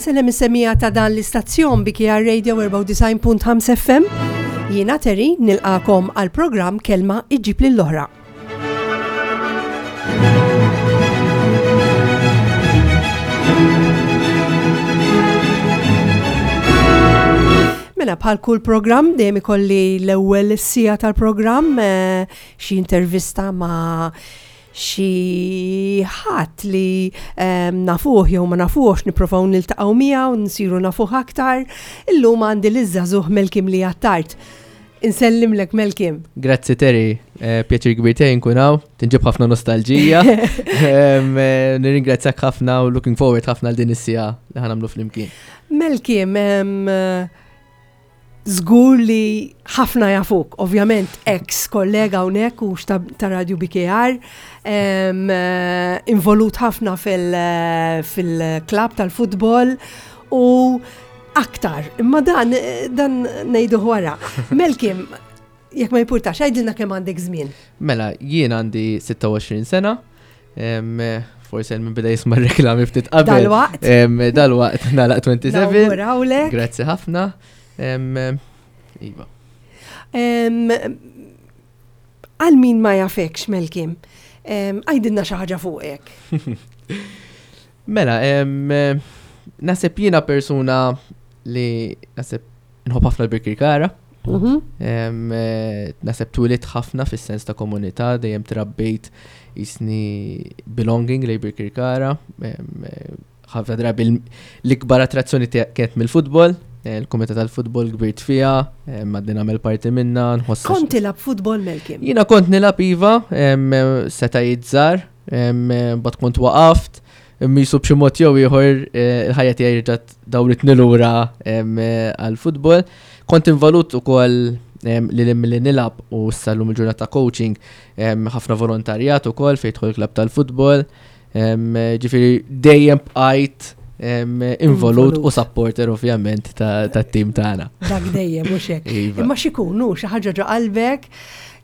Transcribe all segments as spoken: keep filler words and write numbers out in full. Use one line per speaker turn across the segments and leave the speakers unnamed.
Insellem is-semmiegħa ta' dan l-istazzjon B K R Radio erbgħa u disgħin punt ħamsa F M. Jiena Terry, nilqagħkom għal programm Kelma Iġġib lill-Oħra. Mela, bħal kull programm dejjem ikolli l-ewwel siegħa tal-programm eh, xi intervista ma' xi ħadd li um, nafuh jew ma nafuhx, nipprovaw niltaqgħu miegħu, nsiru nafuh aktar. Illum għandi liż-żagħżugħ Melkim li Attard. Insellimlek, Melkim.
Grazzi Terry, eh, pjaċir kbir tiegħi nkun hawn, tinġib ħafna nostalġija. Em, eh, Nirringrazzjak ħafna u looking forward ħafna għal din is-siegħa li ħa nagħmlu flimkien.
Melkim, em, żgur li ħafna jafuk, ovvjament ex kollega hawnhekk u ta', ta' Radio B K R, em, eh, involut ħafna fil-klab tal-futbol u aktar. Imma dan, dan ngħidu wara. Melkim, jekk ma jimpurtax, għidilna kemm għandek żmien.
Mela, jien għandi sitta u għoxrin sena, em, forse minn bida jisma' reklami ftit qabel.
Dal-waqt.
Em, Dal-waqt nagħlaq sebgħa u għoxrin.
Nawgurawlek.
Grazzi ħafna. Em, Iva.
Em, Għal min ma jafekx, Melkim, em, għidilna xi ħaġa fuqek.
Mela, em, naħseb jiena persuna li naħseb nħobb ħafna l-Birkirkara. Em, eh, Naħseb twelidt ħafna fis-sens ta' komunità, dejjem trabbejt jisni belonging lej Birkirkara. Em, eh, Ħafna drabi l- l-ikbar attrazzjoni tiegħi kienet mill-futbol, eh, il-komunità tal-futbol kbirt fija, em, għadni nagħmel parti minna, nħoss.
Kont tilgħab futbol, Melkim?
Jiena kont nilgħab, iva, em, seta' żgħar, but kont waqaft, misu b'xi mod jew ieħor eh, il-ħajja tiegħi rġgħet dawritni lura em, eh, għall-futbol. Kont involut ukoll em, li li li nilgħab u sal-lum il-ġurnata coaching, em, ħafna volontarjat ukoll fejn jidħol klabb tal-futbol. Em, Ġifieri dejjem bqajt em, involut u
Involut.
supporter ovvjament ta' tat-tim tagħna.
Dak dejjem, mhux hekk?
Iva.
Imma x'ikunu xi ħaġa ġo qalbek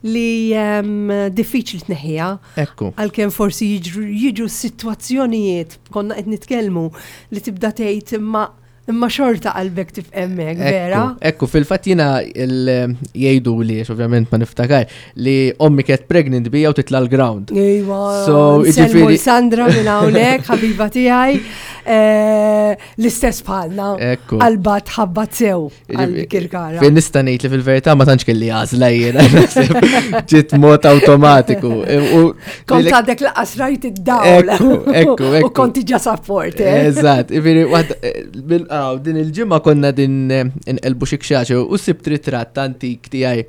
li em, diffiċli tneħħiha.
Ekku.
Għalkemm forsi jiġru, jiġu situazzjonijiet, konna qed nitkellmu, li tibda tgħid imma imma xorta qalbek tibqa' hemmhekk, vera?
Ekku, ekku, fil-fatt jiena il- jgħidu li, għax ovvjament ma niftakar, li ommi kienet pregnant bija u titla l-ground.
Ejwa,
So,
nsellmu
jiġifieri-
Sandra minn hawnhekk, ħabiba tiegħi, eh, l-istess bħalna.
Ekku.
Qalba tħabbat sew għal Kirkara.
Fejn nista' ngħid li fil-verità ma tantx kelli għażla jiena, naħseb ġiet mod awtomatiku. E, U
Kont għadek lanqas rajt id-dawl.
Ekku, ekku,
U
ekku.
kont ġa supporter.
Eżatt, ġifieri, waħda- eh, bil- aw, din il-ġimgħa konna din eh, inqelbu xi kxaċi u sibt ritratt antik tiegħi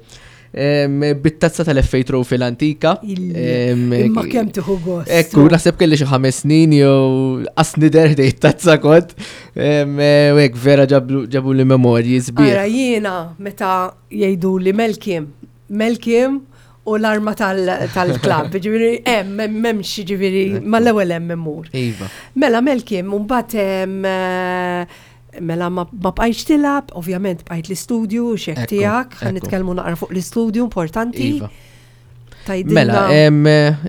em, bit-tazza tal-F A Trophy l-antika.
Il-
Em,
Imma kemm tieħu gost.
Ekku, naħseb kelli xi ħames snin jew qas nidher ħdejn tazza kont. Em, eh, U hekk vera ġablu ġabu li memorji sbieħ.
Ara, jiena meta jgħidu li Melkim, Melkim u l-arma tal-klab, ġifieri hemm m'hemmx, ġifieri mal-ewwel hemm immur.
Iva.
Mela Melkim, mbagħad em, eh, mela ma ma bqajtx tilgħab, ovvjament bqajt l-istudju, xek
Ekku,
tiegħek, ħa
ekku.
nitkellmu naqra fuq l-istudju importanti.
Iva.
Tgħidilna.
Mela, em,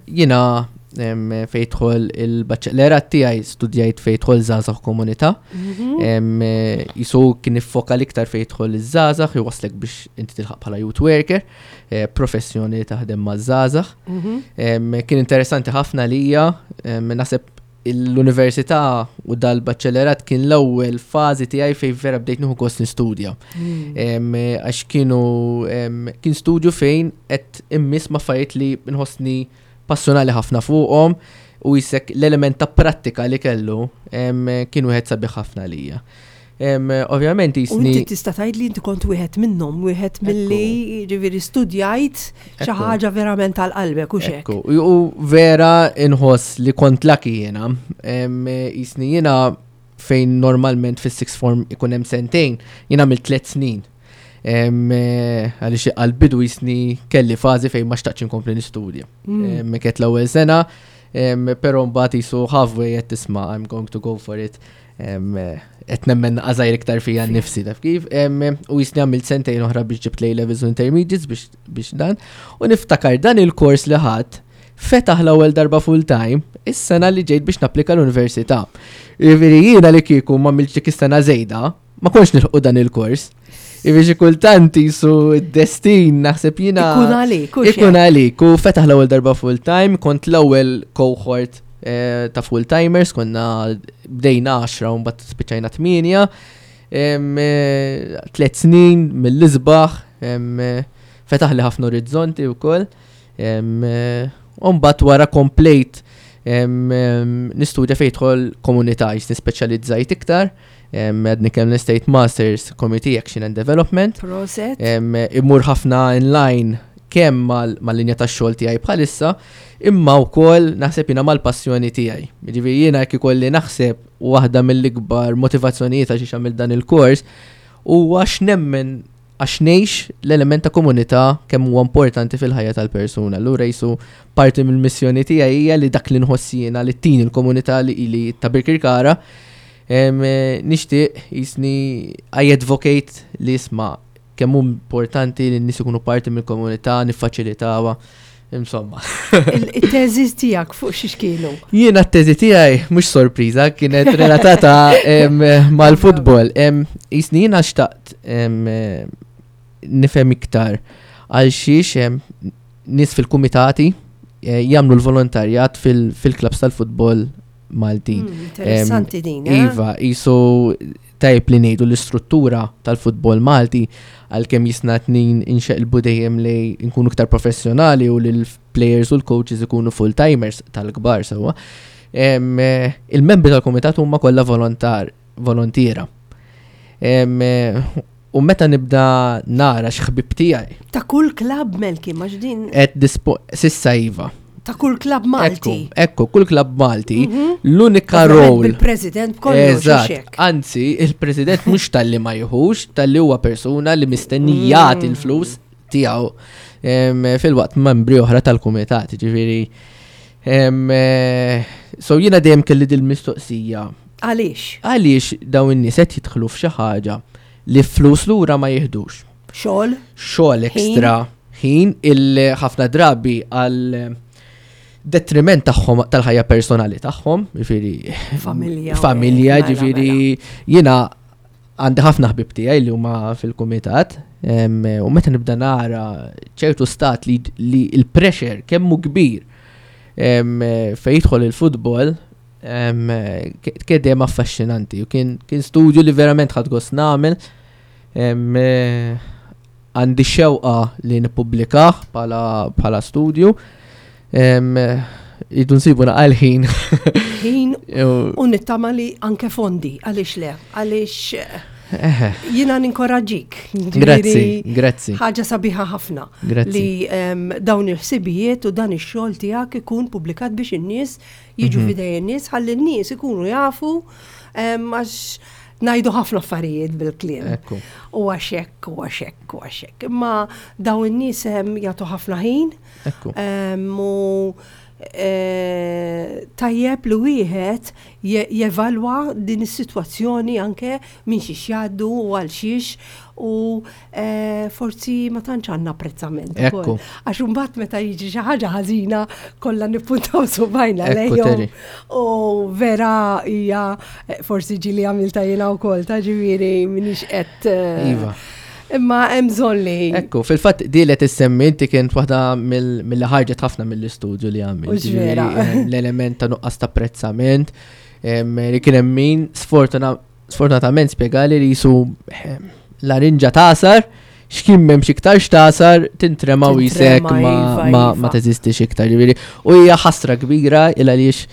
jiena em, fejn jidħol il-baċellerat tiegħi studjajt fejn jidħol żgħażagħ komunità.
Mhm.
Em, eh, Jisu kien iffoka l-iktar fejn jidħol iż-żgħażagħ, jwaslek biex inti tilħaq bħala youth worker, eh, professjoni li taħdem ma' żgħażagħ.
Mhm.
Em, Kien interessanti ħafna lija, em, naħseb l-università u dal-baċellerat kien l-ewwel fażi tiegħi fejn vera bdejt nieħu gost nistudja.
Mm.
Em, Għax kienu em, kien studju fejn qed immiss ma' affarijiet li nħossni passjonali ħafna fuqhom u jisek l-element ta' prattika li kellu em, kien wieħed sabiħ ħafna lija. Em, Ovvjament
U
jisni.
inti tista' tgħid li inti kont wieħed minnhom, wieħed milli ġifieri studjajt xi
Ekku.
ħaġa verament għal qalbek u xek.
Ekku, u u vera inħoss li kont lucky jiena. Em, Jisni jiena fejn normalment fis sixth form ikun hemm sentejn, jiena għamilt tliet snin. Em, eh, Għaliex għal-bidu jisni kelli fażi fejn ma xtaqtx inkompli nistudja.
Mm.
Em, Kienet l-ewwel sena, em, però mbagħad jisu halfway qed tisma' I'm going to go for it. Em, eh, Qed nemmen għażajr iktar fija nnifsi, taf kif. Em, U jisni għamilt sentejn oħra biex ġibt A levels u intermediates biex biex dan. U niftakar dan il-kors li ħadd Fetaħ l-ewwel darba full time, is-sena li ġejt biex napplika l-università. Jiġifieri jiena li kieku ma għamiltx dik is-sena żejda, ma kontx nilħqu dan il-kors. Jiġifieri xi kultant jisu d-destin naħseb jiena.
Ikun għalik, hux
Ikun
hekk?
għalik, u fetaħ l-ewwel darba full time, kont l-ewwel cohort eh, ta' full timers, konna bdejna għaxra u mbagħad spiċċajna tmienja. Em, eh, Tliet snin mill-isbaħ, em, eh, fetaħ li ħafna orizzonti wkoll. Em, eh, U mbagħad wara komplejt em, em, nistudja fejn jidħol komunità, jis nispeċjalizzajt iktar. em, Għadni kemm lestejt Masters Community Action and Development.
Proset.
Em, Immur ħafna inline kemm mal- mal-linja tax-xogħol tiegħi bħalissa, imma wkoll naħseb jiena mal-passjoni tiegħi. Jiġifieri jiena jekk ikolli naħseb waħda mill-ikbar motivazzjonijiet għax għamilt dan il-kors huwa għax nemmen, għax ngħix l-element ta' komunità kemm huwa importanti fil-ħajja tal-persuna. Allura jisu parti mill-missjoni tiegħi hija li dak li nħoss jiena li tin il-komunità li li ta' Birkirkara em, eh, nixtieq jisni I advocate li isma' kemm hu importanti li n-nies ikunu parti mill-komunità, niffaċilitawha. Insomma.
Il-teżi tiegħek fuq xiex kienu?
Jiena t-teżi tiegħi mhux sorpriża, kienet relatata em, mal-futbol. Em, Jisni jiena xtaqt em, eh, nifhem iktar għal xiex em, nies fil-kumitati eh, jagħmlu l-volontarjat fil- fil-klabs tal-futbol Maltin.
Mm, Interessanti din, eh?
Iva, jisu tajb li ngħidu l-istruttura tal-futbol Malti, għalkemm jisna tnin inxeqilbu dejjem li nkunu iktar professjonali u li l-players u l-coaches ikunu full-timers tal-kbar sewwa. Em, eh, Il-membri tal-komitat huma kollha volontar, volontiera. Em, eh, U meta nibda nara x'ħbib tiegħi
Ta' kull klab, Melki, maġ din
qed dispo sissa iva.
Ta' kull klab Malti.
Ekku, ekku, kull klab Malti,
Mhm.
l-unika
Ovvjament
role
bil-president kollox.
Eżatt,
Hekk.
anzi, il-president mhux talli ma jieħux, talli huwa persuna li mistenni jagħti l-flus tiegħu em, fil-waqt membri oħra tal-kumitat, ġifieri. em, eh, So jiena dejjem kelli dil-mistoqsija.
Għaliex?
Għaliex dawn in-nies qed jidħlu f'xi ħaġa li flus lura ma jieħdux?
Xogħol?
Xogħol ekstra, ħin il ħafna drabi għal detriment tagħhom tal-ħajja personali tagħhom, ġifieri
Familja.
Familja,
mela,
ġifieri jiena għandi ħafna ħbib tiegħi li huma fil-kumitat, em, u meta nibda nara ċertu stat li, li il-pressure kemm hu kbir em, fejn jidħol il-futbol, em, ke- kien dejjem affaxxinanti u kien kien studju li verament ħadt gost nagħmel. Em, eh, Għandi xewqa li nippubblikah bħala bħala studju. Em, Idu nsibu naqal ħin.
Ħin
U-
u nittama li anke fondi, għaliex le? Għaliex eh,
Eħe.
jiena ninkoraġġik.
Grazzi,
Ġifieri,
grazzi.
ħaġa sabiħa ħafna
Grazzi.
li em, dawn il-ħsibijiet u dan ix-xogħol tiegħek ikun publikat biex in-nies jiġu
Mhm.
f'idej in-nies, ħalli n-nies ikunu jafu em, għax ngħidu ħafna affarijiet bil-kliem.
Ekku.
U għax hekk, u għax hekk, u għax hekk. Imma dawn in-nies em, jagħtu ħafna ħin
Ekku.
em, u eh, tajjeb li wieħed je- jevalwa din is-sitwazzjoni anke minn xiex jgħaddu u għal xiex u eh, forsi ma tantx għandna apprezzament
Ekku.
ukoll. Għax imbagħad meta jiġi xi ħaġa ħażina kollha nippuntaw subajna
Ekku,
lejhom.
Terry.
U vera hija eh, forsi ġieli għamilta jiena wkoll ta' ġifieri minix qed eh,
Iva.
Imma hemm bżonn li
Ekku, fil-fatt di li tissemmi inti kienet waħda mill- mill ħarġet ħafna mill-istudju li għamil.
U vera.
Ġifieri, l-element ta' nuqqas ta' apprezzament, em, li kien hemm min sfortuna- sfortunatament spjegali li jisu em, larinġa tasar, x'kien m'hemmx iktar x'tasar, tintrema u jisek
Tintrema,
ma,
iva,
ma,
iva.
ma teżistix iktar. Ġifieri, u hija ħasra kbira il għaliex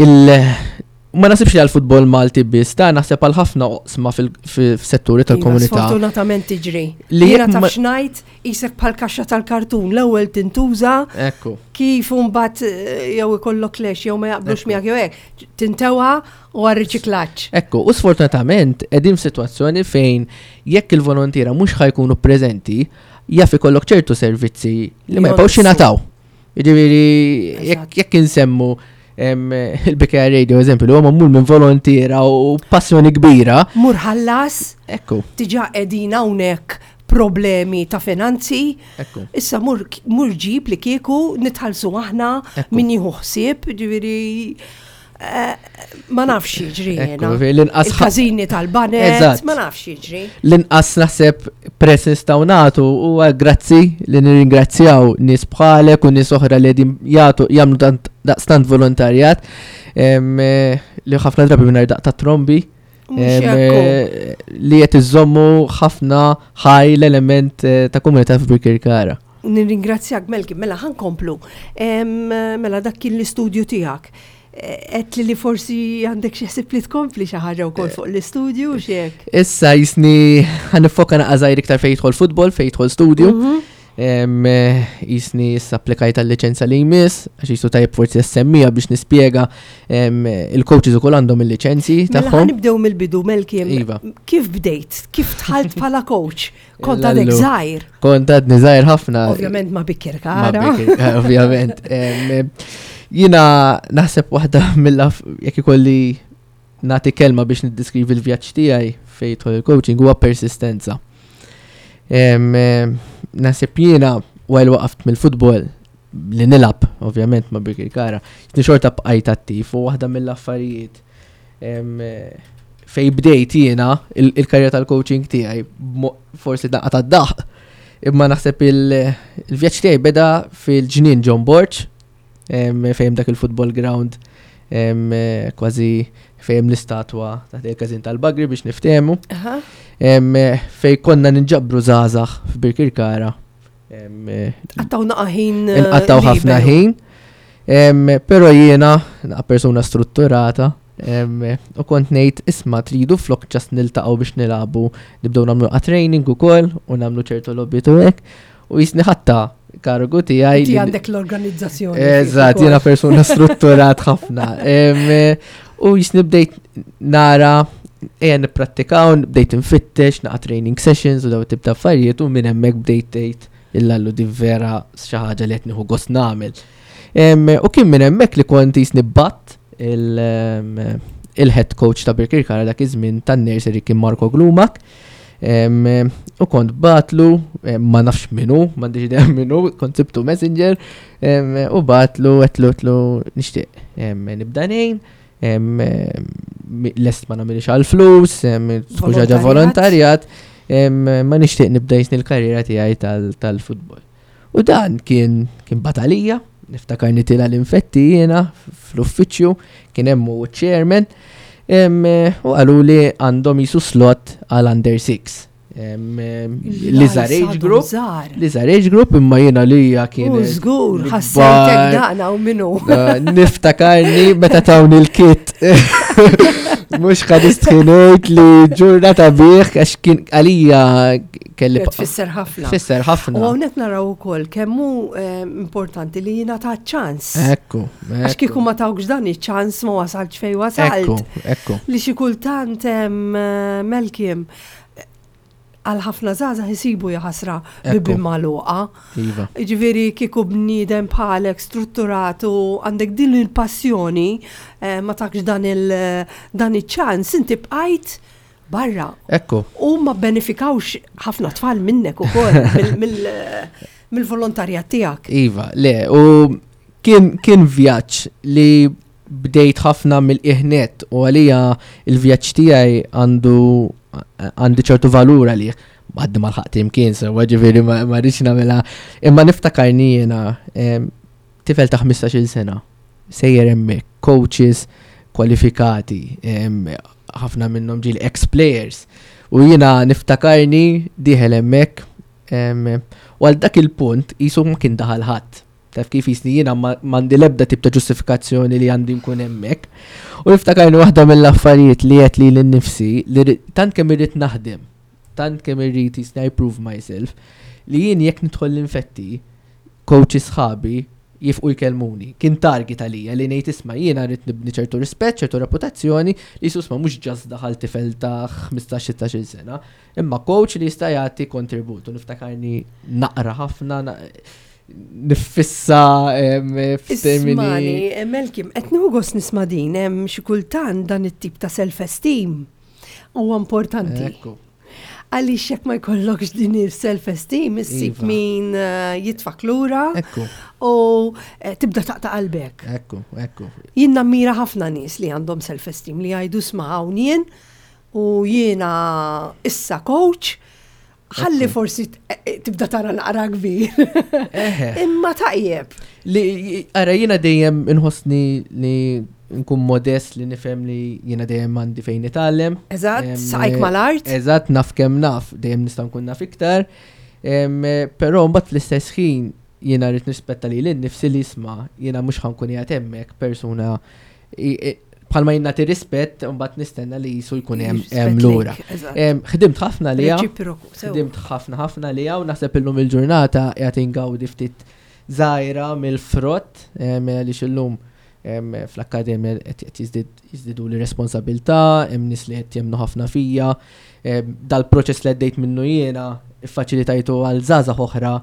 il ma nasibx li għal-futbol Malti biss, ta' naħseb għal ħafna oqsma fil-setturi
Iva,
tal-komunità.
Sfortunatament tiġri.
Li
Jiena
jekk
taf
ma-
x'ngħid, isek bħal kaxxa tal-kartun, l-ewwel tintuża,
Ekku.
kif imbagħad eh, jew ikollok lex jew ma jaqblux
Ekku.
miegħek jew hekk, tintewa u għar-riċiklaġġ.
Ekku, u sfortunatament qegħdin f'sitwazzjoni fejn jekk il-volontiera mhux ħa jkunu preżenti, jaf ikollok ċertu servizzi li ma jibqgħux
Jonqsu.
jingħataw. Jiġifieri jekk
Eżatt.
jekk insemmu em, il-B K R Radio eżempju li huwa magħmul minn volontiera u passjoni kbira.
Mur ħallas,
Ekku.
diġà qegħdin hawnhekk problemi ta' finanzi.
Ekku.
Issa mur, mur ġib li kieku nitħallsu aħna
Ekku.
min jieħu ħsieb, ġifieri eh, ma nafx jiġri
Ekku,
jiena.
l-inqas ħa-
Il-każini tal-baned,
Eżatt.
ma nafx jiġri.
L-inqas naħseb prezz nistgħu nagħtu huwa grazzi li nirringrazzjaw nies bħalek u nies oħra li qegħdin jagħtu jagħmlu tant daqstant volontarjat em, eh, li ħafna drabi mingħajr daqq ta' trombi
Mhux
em,
hekk hu.
eh, li qed iżommu ħafna ħaj l-element eh, ta' komunità f'Birkirkara.
Nirringrazzjak Melki, mela ħa nkomplu. Em, Mela dak kien l-istudju tiegħek. Għedt li li forsi għandek xi ħsieb li tkompli xi ħaġa wkoll fuq l-istudju u x'hekk.
Issa jisni ħa niffoka naqra żgħir iktar fejn jidħol futbol, fejn jidħol studju.
Mhm.
Em, eh, Jisni issa applikajt għal-liċenza li jmiss, għax jisu tajjeb forsi semmija biex nispjega em, il-coaches ukoll għandhom il-liċenzi
Mela
tagħhom.
ħa nibdew mill-bidu Melki.
Iva.
Kif bdejt? Kif dħalt bħala coach? Kont għadek
Lallu.
żgħir.
Kont għadni żgħir ħafna.
Ovvjament ma
Ma
Bikirkara.
Bikir- eh, Ovvjament. Em, eh, Jiena naħseb waħda mill jekk ikolli nagħti kelma biex niddeskrivi l-vjaġġ tiegħi fejn jidħol il-coaching huwa persistenza. Em, eh, Naħseb jiena while waqaft mill-futbol li nilgħab, ovvjament ma' Birkirkara, jisni xorta bqajt attiv u waħda mill-affarijiet em, eh, fej bdejt jiena il- il-karriera tal-coaching tiegħi mo- forsi daqqa tad-daħ imma naħseb il- il-vjaġġ tiegħi beda fil-ġnien John Borg em, fejn dak il-football ground em, eh, kważi fejn l-istatwa taħt il-każin tal-Bagri biex niftehmu
Aha.
em, eh, fej konna ninġabru żgħażagħ f'Birkirkara. Em, eh,
Qattgħu naqa ħin. eh,
Inqattgħu ħafna
liberu.
ħin. Em, Pero jiena naqa persuna strutturata em, u kont ngħid isma' tridu flok just niltaqgħu biex nilagħbu nibdew nagħmlu a training ukoll u nagħmlu ċertu lobby u hekk u jisni ħatta kargu tiegħi
Inti
li-
għandek l-organizzazzjoni.
Eżatt, jiena persuna strutturat ħafna. Em, eh, U jisni bdejt nara ejja nipprattikaw, bdejt nfittex, naqa training sessions u daw tip ta' affarijiet u minn hemmhekk bdejt tgħid illallu di vera xi ħaġa li qed nieħu gost nagħmel. Em, U kien minn hemmhekk li kont jisni bat il- em, il-head coach ta' Birkirkara dak iż-żmien tan-nursery kien Marko Glumak. Em, U kont bgħattlu, em, ma nafx minnu, m'għandix idea minnu, kont sibtu messenger, em, u bgħattlu, għedtlu, għedtlu, nixtieq em, nibda ngħin, em, em, lest ma nagħmilx għal-flus, em, tkun xi ħaġa volontarjat, em, ma nixtieq nibda jisni l-karriera tiegħi tal- tal-futbol. U dan kien kien batalija, niftakar nitila l-infetti jiena fl-uffiċċju, kien hemm u chairman, em, u qalu li għandhom jisu slot għal under six. L-iżgħar age group, l-iżgħar age group imma jiena li hija kien.
U żgur, ħassejtek daqna u minnu.
Niftakarni meta tawni l-kit. Mhux ħa nistħi ngħid li ġurnata bih għax kien għalija kelli.
Tfisser ħafna.
Tfisser ħafna.
U hawnhekk naraw ukoll kemm hu eh, importanti li jingħata ċans.
Ekku.
Għax kieku ma tawkx dan iċ-ċans ma wasalx fej wasalt.
Ekku, ekku.
Li xi kultant em, eh, Melkim għal ħafna żgħażagħ jisibu jaħasra bibien magħluqa.
Iva.
Ġifieri kieku bniedem bħalek strutturat u għandek din il-passjoni eh, ma takx dan il dan iċ-ċans inti bqajt barra.
Ekku.
U ma benefikawx ħafna tfal minnek ukoll mill-volontarjat tiegħek.
Iva, le, u kien, kien vjaġġ li bdejt ħafna mill-iħnet u għalija il-vjaġġ tiegħi għandu għandi ċertu valur għalih. Għaddi ma lħaqt imkien, so ġifieri ma ma rridx nagħmilha. Imma niftakarni jiena em, tifel ta' ħmistax-il sena, sejjer hemmhekk, coaches kwalifikati, em, ħafna minnhom ġieli ex-players. U jiena niftakarni dieħel hemmhekk em, u għal dak il-punt jisu ma kien daħal ħadd. Taf kif jisni jiena ma- m'għandi l-ebda tip ta' ġustifikazzjoni li għandi nkun hemmhekk. U niftakarni waħda mill-affarijiet li għedt lili nnifsi li ri- tant kemm irrid naħdem, tant kemm irrid jisni I prove myself, li jien jekk nidħol l-infetti, coaches sħabi jifqu jkellmuni. Kien target għalija li ngħid isma' jiena rrid nibni ċertu rispett, ċertu reputazzjoni li susma mhux just daħal tifel ta' ħmistax sittax-il sena, imma coach li jista' jagħti kontribut. U niftakarni naqra ħafna, na- nifissa em, f'termini.
Ismani, eh, Melkim, qed nieħu gost nisma' din, hemm xi kultant dan it-tip ta' self-esteem huwa importanti.
Ekku.
Għaliex jekk ma jkollokx din il-self-esteem, issib
Iva.
min eh, jitfak lura
Ekku,
u eh, tibda taqta' qalbek.
ekku, ekku.
Jien nammira ħafna nies li għandhom self-esteem li jgħidu isma' hawn jien u jiena issa coach, ħalli forsi t- eh, tibda tara naqra kbir.
Eħe.
Imma tajjeb.
Li, ara, jiena dejjem inħossni li nkun modest, li nifhem li jiena dejjem għandi fejn nitgħallem.
Eżatt,
Em,
saqajk mal-art.
Eżatt, naf kemm naf, dejjem nista' nkun naf iktar. Em, Però mbagħad fl-istess ħin jiena rrid nirrispetta lili nnifsi li isma' jiena mhux ħa nkun qiegħed hemmhekk persuna i- i- bħalma jien nagħti rispett, mbagħad nistenna li jisu jkun hemm hemm
Rispett
lura.
lejk, eżatt.
Em, Ħdimt ħafna li
Reċiproku, sew.
ħdimt ħafna ħafna li u naħseb illum il-ġurnata qiegħed ingawdi ftit żgħira mill-frott em, li illum em, fl-akkademja qed qed jiżdied- jiżdiedu li responsabilità, hemm nies li qed jemmnu ħafna fija, em, dal-proċess li għaddejt minnu jiena iffaċilitajtu għal żgħażagħ oħra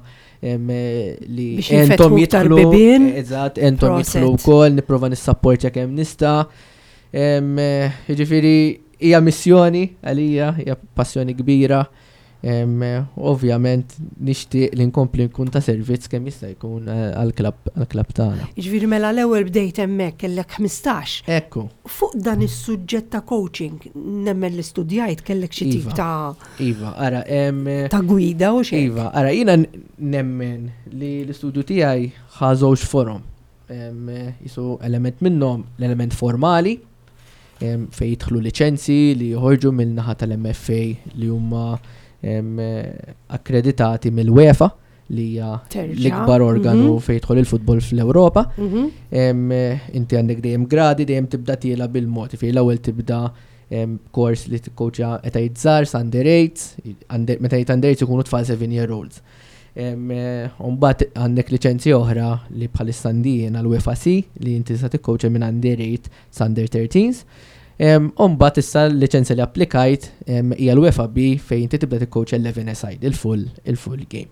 em, li
Biex
entom
jinfetħu iktar
jidħlu,
bibien.
eżatt, entom
Proset.
jidħlu wkoll, nipprova nissapportja kemm nista'. Em, eh, Jiġifieri hija missjoni għalija, hija passjoni kbira. Em, eh, Ovvjament nixtieq li nkompli nkun ta' servizz kemm jista' jkun eh, għall-klabb għall-klabb tagħna.
Jiġifieri mela l-ewwel bdejt hemmhekk kellek ħmistax.
Ekku,
Fuq dan is-suġġett ta' coaching, nemmen li studjajt kellek xi tip
Iva.
ta'
Iva, ara, em, eh,
ta' gwida u xejn.
Iva, ara, jiena n- nemmen li l-istudju tiegħi ħa żewġ forom. Em, eh, Jisu element minnhom l-element formali, em, fej jidħlu liċenzi li joħorġu mill-naħa tal-M F A li huma em, eh, akkreditati mill-UEFA li hija
Terġa'.
l-ikbar organu
Mhm.
fejn jidħol il-futbol fl-Ewropa.
Mhm.
Em, eh, Inti għandek dejjem gradi, dejjem tibda tiela bil-mod. Fej l-ewwel tibda em, kors li tikkoċja etajiet żgħar, under eight, under- meta jgħid under eight ikunu tfal seven year olds. Em, eh, Mbagħad għandek liċenzji oħra li bħalissa għandi għal UEFA C li inti sa tikkoċja minn under eight sa under thirteens. Mbagħad issa l-liċenzja li applikajt em, hija l-UEFA B fejn inti tibda tikkoċja eleven aside, il-full il-full game.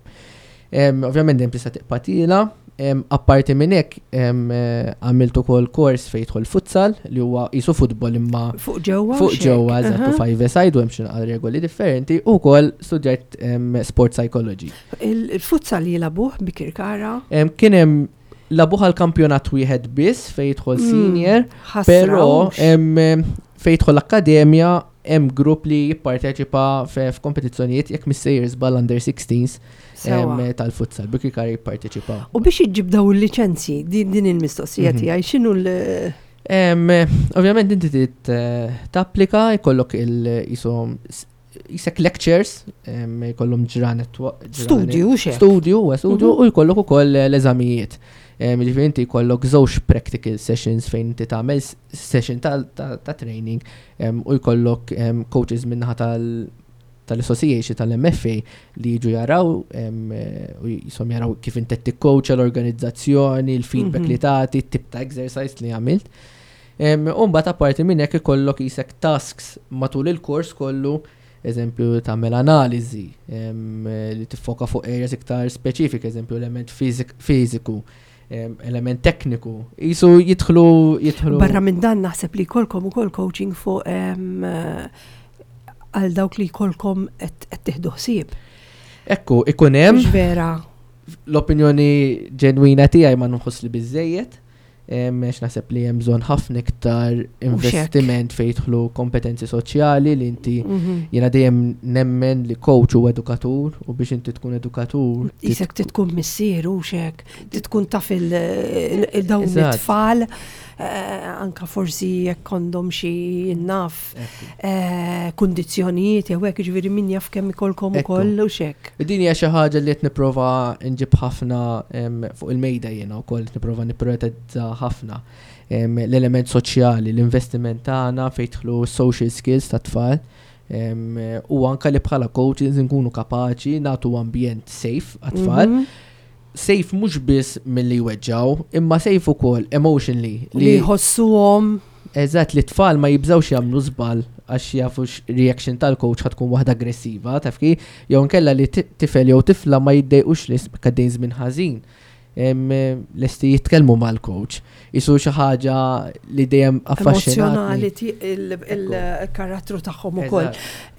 Em, Ovvjament dejjem tista' tibqa' tiela. Em, Apparti minn hekk em, eh, għamilt ukoll kors fejn jidħol futsal li huwa qisu futbol imma
Fuq ġewwa.
fuq
u xek.
ġewwa, eżatt, u
Aha.
five aside u hemm xi naqra regoli differenti, u wkoll studjajt em, sport psychology.
Il- Il-futsal jilagħbuh Bikirkara.
Em, Kien hemm lagħbuh għal kampjonat wieħed biss fejn jidħol
Mm,
senior,
ħasra
però
hux.
em, em, fejn jidħol l-akkademja hemm grupp li jipparteċipa fe- f'kompetizzjonijiet, jekk missejjer żball, under sixteens
Sewa.
em, tal-futsal, Bikirkara jipparteċipaw.
U biex iġġib daw il-liċenzji, din din il-mistoqsija
Mhm.
tiegħi, x'inhu l-
Em, Ovvjament inti trid eh, tapplika, jkollok il jisom jisek lectures, em, jkollhom ġranet wa- ġranet-
Studju xek.
Studju, huwa studju,
Mhm.
u jkollok ukoll l-eżamijiet. Em, Ġifieri inti jkollok żewġ practical sessions fejn inti tagħmel s- session ta', ta, ta training em, u jkollok em, coaches minnaħa tal tal-association tal-M F A li jiġu jaraw em, eh, u jisom jaraw kif inti tikkoċa, l-organizzazzjoni, il-feedback
Mhm.
li tagħti, tip ta' exercise li għamilt. Em, U mbagħad apparti minn hekk ikollok jisek tasks matul il-kors kollu, eżempju tagħmel analiżi em, li tiffoka fuq areas iktar speċifik, eżempju element fizik- fiżiku, em, element tekniku. Jisu jidħlu jidħlu
Barra minn dan naħseb li jkollkom ukoll coaching fuq em, eh, għal dawk li jkollkom qed qed tieħdu ħsieb.
Ekku, ikun hemm
Mhux vera.
L-opinjoni ġenwina tiegħi, ma nħoss li biżejjed, em, għax naħseb li hemm bżonn ħafna iktar investiment fejn jidħlu kompetenzi soċjali li inti
Mhm.
jiena dejjem nemmen li coach u edukatur, u biex inti tkun edukatur tit-
Isek titkun missier u xek, titkun taf il- il- dawn
Eżatt.
it-tfal, eh, anka forsi jekk għandhom xi naf
Ekku.
eh, kundizzjonijiet jew hekk, ġifieri min jaf kemm ikolkom
Ekku.
ukoll u xek.
Din hija xi ħaġa li qed nipprova nġib ħafna em, fuq il-mejda jiena wkoll, qed nipprova nipprioritizza ħafna em, l-element soċjali, l-investiment tagħna fejn jidħlu social skills ta' tfal em, u anka li bħala coaches nkunu kapaċi nagħtu ambjent safe għat-tfal.
Mhm.
Safe mhux biss milli jweġġaw, imma safe ukoll emotionally.
Li jħossuhom.
Eżatt, li tfal ma jibżawx jagħmlu żball għax jafu reaction tal-coach ħa tkun waħda aggressiva, taf kif, jew nkella li ti- tifel jew tifla ma jiddejqux li għaddejn żmien ħażin. Lesti jitkellmu mal-coach. Qisu xi ħaġa li dejjem
affaxxinatni. Il-karattru tagħhom ukoll.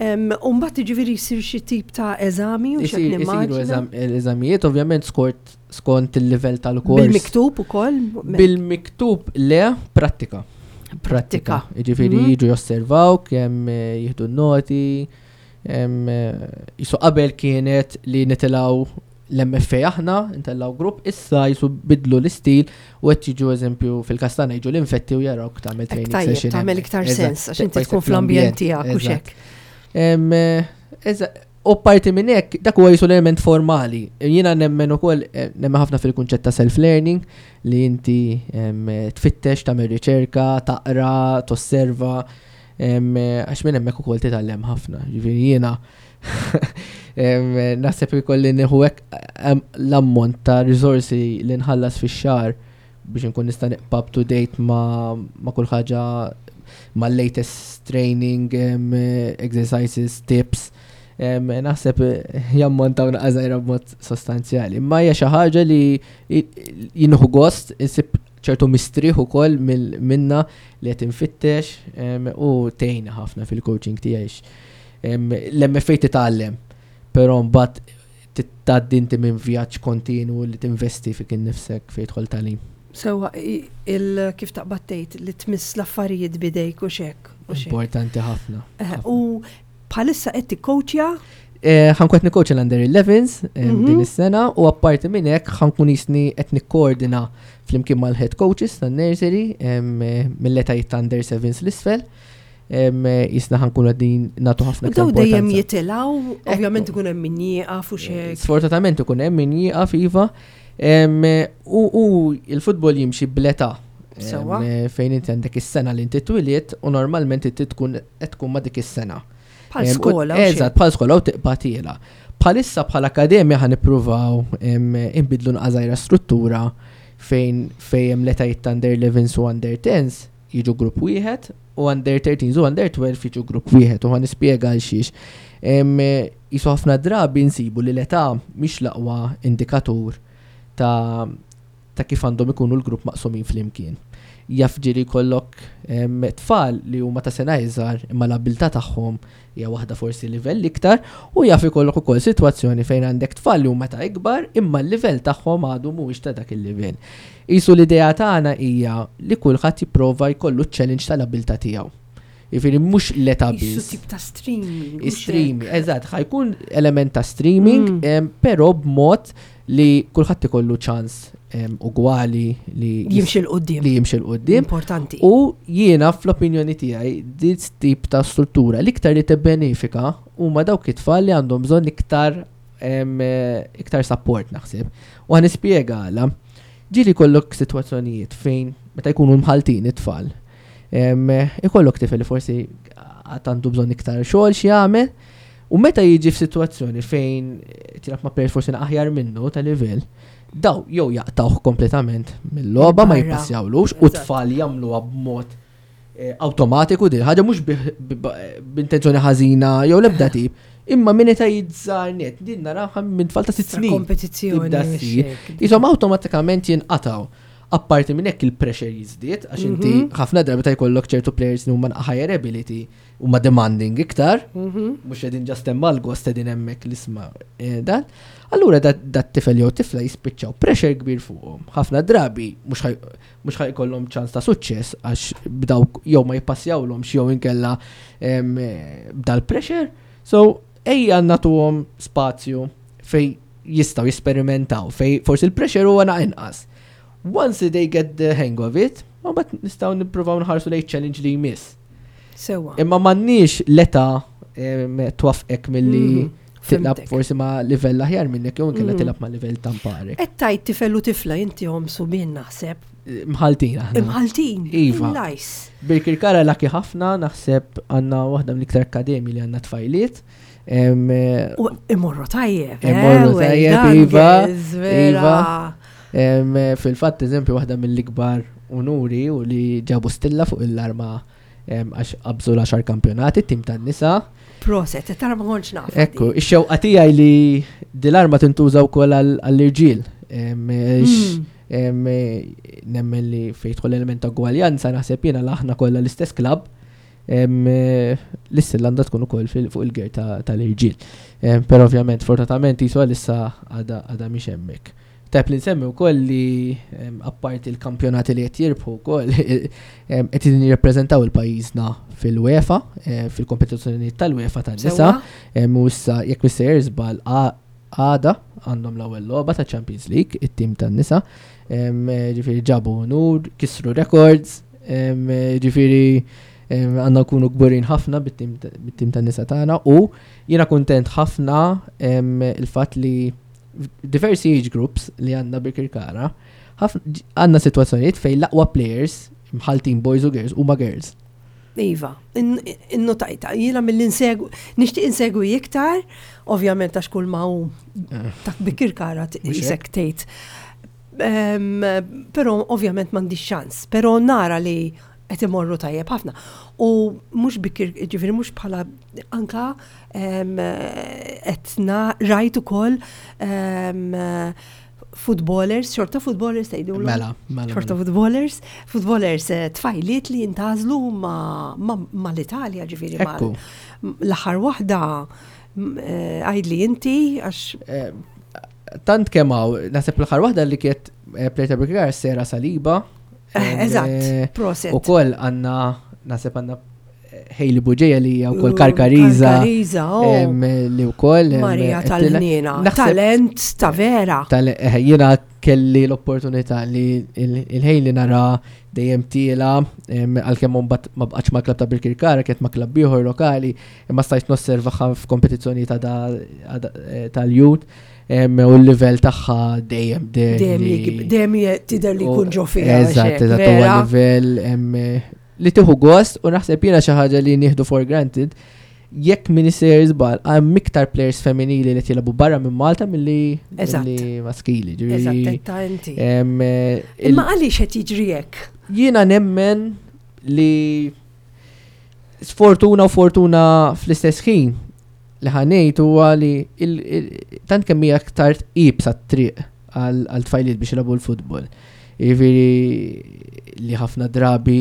U mbagħad jiġifieri jsir xi tip ta' eżami u xi
Isiru eżamijiet, ovvjament skont skont il-livell tal-kors.
Bil-miktub ukoll?
Bil-miktub le, prattika.
Prattika.
Jiġifieri mhm. jiġu josservaw kemm eh, jieħdu noti. Qisu qabel kienet li nitilgħu l-M F A aħna, ntellgħu grupp, issa qisu bidlu l-istil u qed jiġu, eżempju, fil-kastana jiġu l-infetti u jarawk tagħmel
training session. Tagħmel iktar sens għax inti tkun fl-ambjent tiegħek u hekk.
U parti minn hekk, dak huwa qisu l-element formali. Jiena nemmen ukoll, eh, nemmen ħafna fil-kunċett ta' self-learning li inti tfittex, tagħmel riċerka, taqra, tosserva, għax minn hemmhekk ukoll titgħallem ħafna. Ġifieri jiena naħseb ikolli nieħu hekk l-ammont ta' riżorsi li nħallas fix-xahar biex nkun nista' nibqa' up to date ma' ma' kull ħaġa, ma' latest training, exercises, tips, naħseb jammontaw naqra b'mod sostanzjali. Imma hija xi ħaġa li jien nieħu gost, insib ċertu mistrieħ ukoll minna li qed infittex u tgħinna ħafna fil-coaching tiegħi. L-M F A titgħallem, però mbagħad tgħaddi inti minn vjaġġ kontinu li tinvesti fik innifsek fejn jidħol tagħlim.
Sewa, il kif taqbad tgħid li tmiss l-affarijiet bidejk u hekk.
Importanti ħafna.
Eh, u bħalissa qed tikkowċja?
Eh, ħa nkun qed nikkowċja l-Under elevens mhm. din is-sena u apparti minn hekk ħa nkun qisni qed nikkoordina flimkien mal-head coaches tan-nursery mill-etajiet ta' Under sevens 'l isfel. Qisna ħa nkunu qegħdin nagħtu ħafna.
Daw dejjem jitilgħu, ovvjament ikun hemm min jieqaf u hekk.
Sfortunatament ikun hemm min jieqaf, iva. U il-futbol jimxi bl-età. Fejn inti għandek is-sena li inti twilidt u normalment inti tkun qed tkun ma' dik is-sena.
Bħal skola.
Eżatt, bħal skola u tibqa' tiela'. Bħalissa bħala akademja ħa nippruvaw imbidlu naqra struttura fejn fejn l-etajiet ta' under elevens u under tens jiġu grupp wieħed u under thirteens u under twelve jiġu grupp wieħed u ħa nispjega għal xiex. Qisu ħafna drabi nsibu li l-età mhix l-aqwa indikatur ta' ta' kif għandhom ikunu l-grupp maqsumin flimkien. Jaf ġieli jkollok tfal li huma ta' sena iżgħar imma l-abilità tagħhom hija waħda forsi livell iktar u jaf ikollok ukoll sitwazzjoni fejn għandek tfal li huma ta' ikbar imma l-livell tagħhom għadu mhuwiex ta' dak il-livell. Qisu l-idea tagħna hija li kulħadd jipprova jkollu challenge tal-abilità tiegħu. Jiġifieri mhux l-età biss.
Tip ta' streaming.
Streaming, eżatt, ħa jkun element ta' streaming, mm. però b'mod li kulħadd ikollu ċans ugwali li
jimxi 'l quddiem.
Li jimxi 'l quddiem.
Importanti.
U jiena fl-opinjoni tiegħi dit tip ta' struttura l-iktar li tibbenefika huma dawk it-tfal li għandhom bżonn iktar iktar support, naħseb. U ħa nispjega għala. Ġieli jkollok sitwazzjonijiet fejn meta jkunu mħaltin it-tfal, ikollok tifel li forsi għandu bżonn iktar xogħol xi jagħmel, u meta jiġi f'sitwazzjoni fejn tilgħab ma' player forsi aħjar minnu ta' livell, daw jew jaqtawh kompletament mill-logħba, ma jippassjawlux, u tfal jagħmluha b'mod eh, awtomatiku din ħaġa, mhux b'intenzjoni ħażina jew l-ebda tip, imma minn età żgħar net, din naraha minn tfal ta' sitt snin.
Kompetizzjoni.
Qishom awtomatikament jinqataw. Apparti minn hekk il-pressure jiżdied għax inti mhm. ħafna drabi ta' jkollok ċertu players li huma higher ability, huma demanding iktar, mhm. mhux qegħdin just hemm għal-gost, qegħdin hemmhekk l-isma' eh, dan. Allura dat tifel jew tifla jispiċċaw pressure kbir fuqhom. Ħafna drabi mhux ħa jkollhom ċans ta' suċċess għax bdaw jew ma jippassjawlhomx jew inkella b'dal-pressure. So ejja nagħtuhom spazju fej jistgħu jesperimentaw, fej forsi il-pressure huwa inqas. Once they get the hang of it, ma bat nistgħu nippruvaw nħarsu lejn challenge li jmiss.
Sewa.
Imma m'għandniex l-età twaqqfek milli mm -hmm. tilgħab forsi ma' livell aħjar minnek jew inkella mm. tilgħab ma' livell tamparek.
Qed tgħid tifel u tifla, inti hom subien, naħseb.
Mħaltin aħna.
Mħaltin.
Iva.
Nice.
Birkirkara lucky ħafna, naħseb għandna waħda mill-iktar akademi li għandna tfajliet.
U imorru tajjeb.
Eh, imorru tajjeb, iva. Iva. Fil-fatt, eżempju, waħda mill-ikbar unuri u li ġabu stilla fuq l-arma għax qabżu l-għaxar kampjonati, tim tan-nisa.
Proset, tara ma kontx naf.
Ekku, ix-xewqa tiegħi li dil-arma tintuża wkoll għall-irġiel. Em, x- em, Nemmen li fejn jidħol element ta' ugwaljanza, naħseb jiena aħna kollha l-istess klabb. em, L-istilla għandha tkun ukoll fil- fuq il-gear ta- tal-irġiel. Em, Però ovvjament, fortunatament, jisu għalissa għada għada mhix hemmhekk. Tajb li nsemmi wkoll li em, apparti il-kampjonati li qed jirbħu wkoll em, qed jirrappreżentaw il-pajjiżna fil-UEFA, eh, fil-kompetizzjonijiet tal-UEFA tan-nisa.
Sewwa?
Em, U issa jekk missejjer żball, għada għandhom l-ewwel logħba ta' Champions League, it-tim tan-nisa. Em, eh, Ġifieri ġabu unur, kisru records, em, eh, ġifieri em, għandna nkunu kburin ħafna bit-tim bit-tim tan-nisa tagħna u jiena kuntent ħafna em, il-fatt li diversi age groups li għandna Birkirkara, ħafna- għandna situazzjonijiet fejn l-aqwa players mħaltin boys u girls huma girls.
Iva, in- innotajta, jiena mill-insegu, nixtieq insegwi iktar, ovvjament għax kull ma hu ta' Birkirkara
Mhux
jisek tgħid. Em, Però ovvjament m'għandix ċans, però nara li qed imorru tajjeb ħafna. U mhux Birkir, ġifieri mhux bħala anka em, qed na- rajt ukoll em, footballers, xorta footballers tgħidu.
Mela, mela.
Xorta
mela.
footballers, footballers eh, tfajliet li jintgħażlu ma, ma, ma l-Italja, ġifieri ma
Ekku.
l-aħħar waħda m- eh, għidli inti għax
Eh, Tant kemm hawn, naħseb l-aħħar waħda li kienet eh, player ta' Birkirkara, Sera Saliba.
eh, eżatt, proset.
U koll għandna, naħseb għandna Hailey Buġeja li hija wkoll Karkariza.
Karkariza, oh.
em, Li wkoll. em,
Marija
qed
tal-ħniena,
naħseb-
talent ta' vera.
tal eh, jiena kelli l-opportunità li il-Hailey nara dejjem tiela, em, għalkemm mbagħad ma bqgħetx ma' klab ta' Birkirkara, kienet ma' klab ieħor lokali, imma stajt nosservaha f'kompetizzjoni ta' da- għada- eh, tal-youth em, u l-livell tagħha dejjem
Dejjem
li-
jigib- dejjem je- tidher li
u-
jkun ġo fiha.
Eżatt, eżatt, huwa
vera.
livell em, li tieħu gost u naħseb jiena xi ħaġa li nieħdu for granted, jekk m'iniex sejjer żball, hemm iktar players femminili li jilagħbu barra minn Malta milli
Eżatt.
milli maskili.
Eżatt,
Ġifieri,
ta' inti.
em, eh, il-
Imma għaliex qed jiġri hekk?
Jiena nemmen li sfortuna u fortuna fl-istess ħin li ħa ngħid huwa li il- il- tant kemm hija aktar iebsa t-triq għal għal tfajliet biex jilagħbu l-futbol. Jiġifieri li ħafna drabi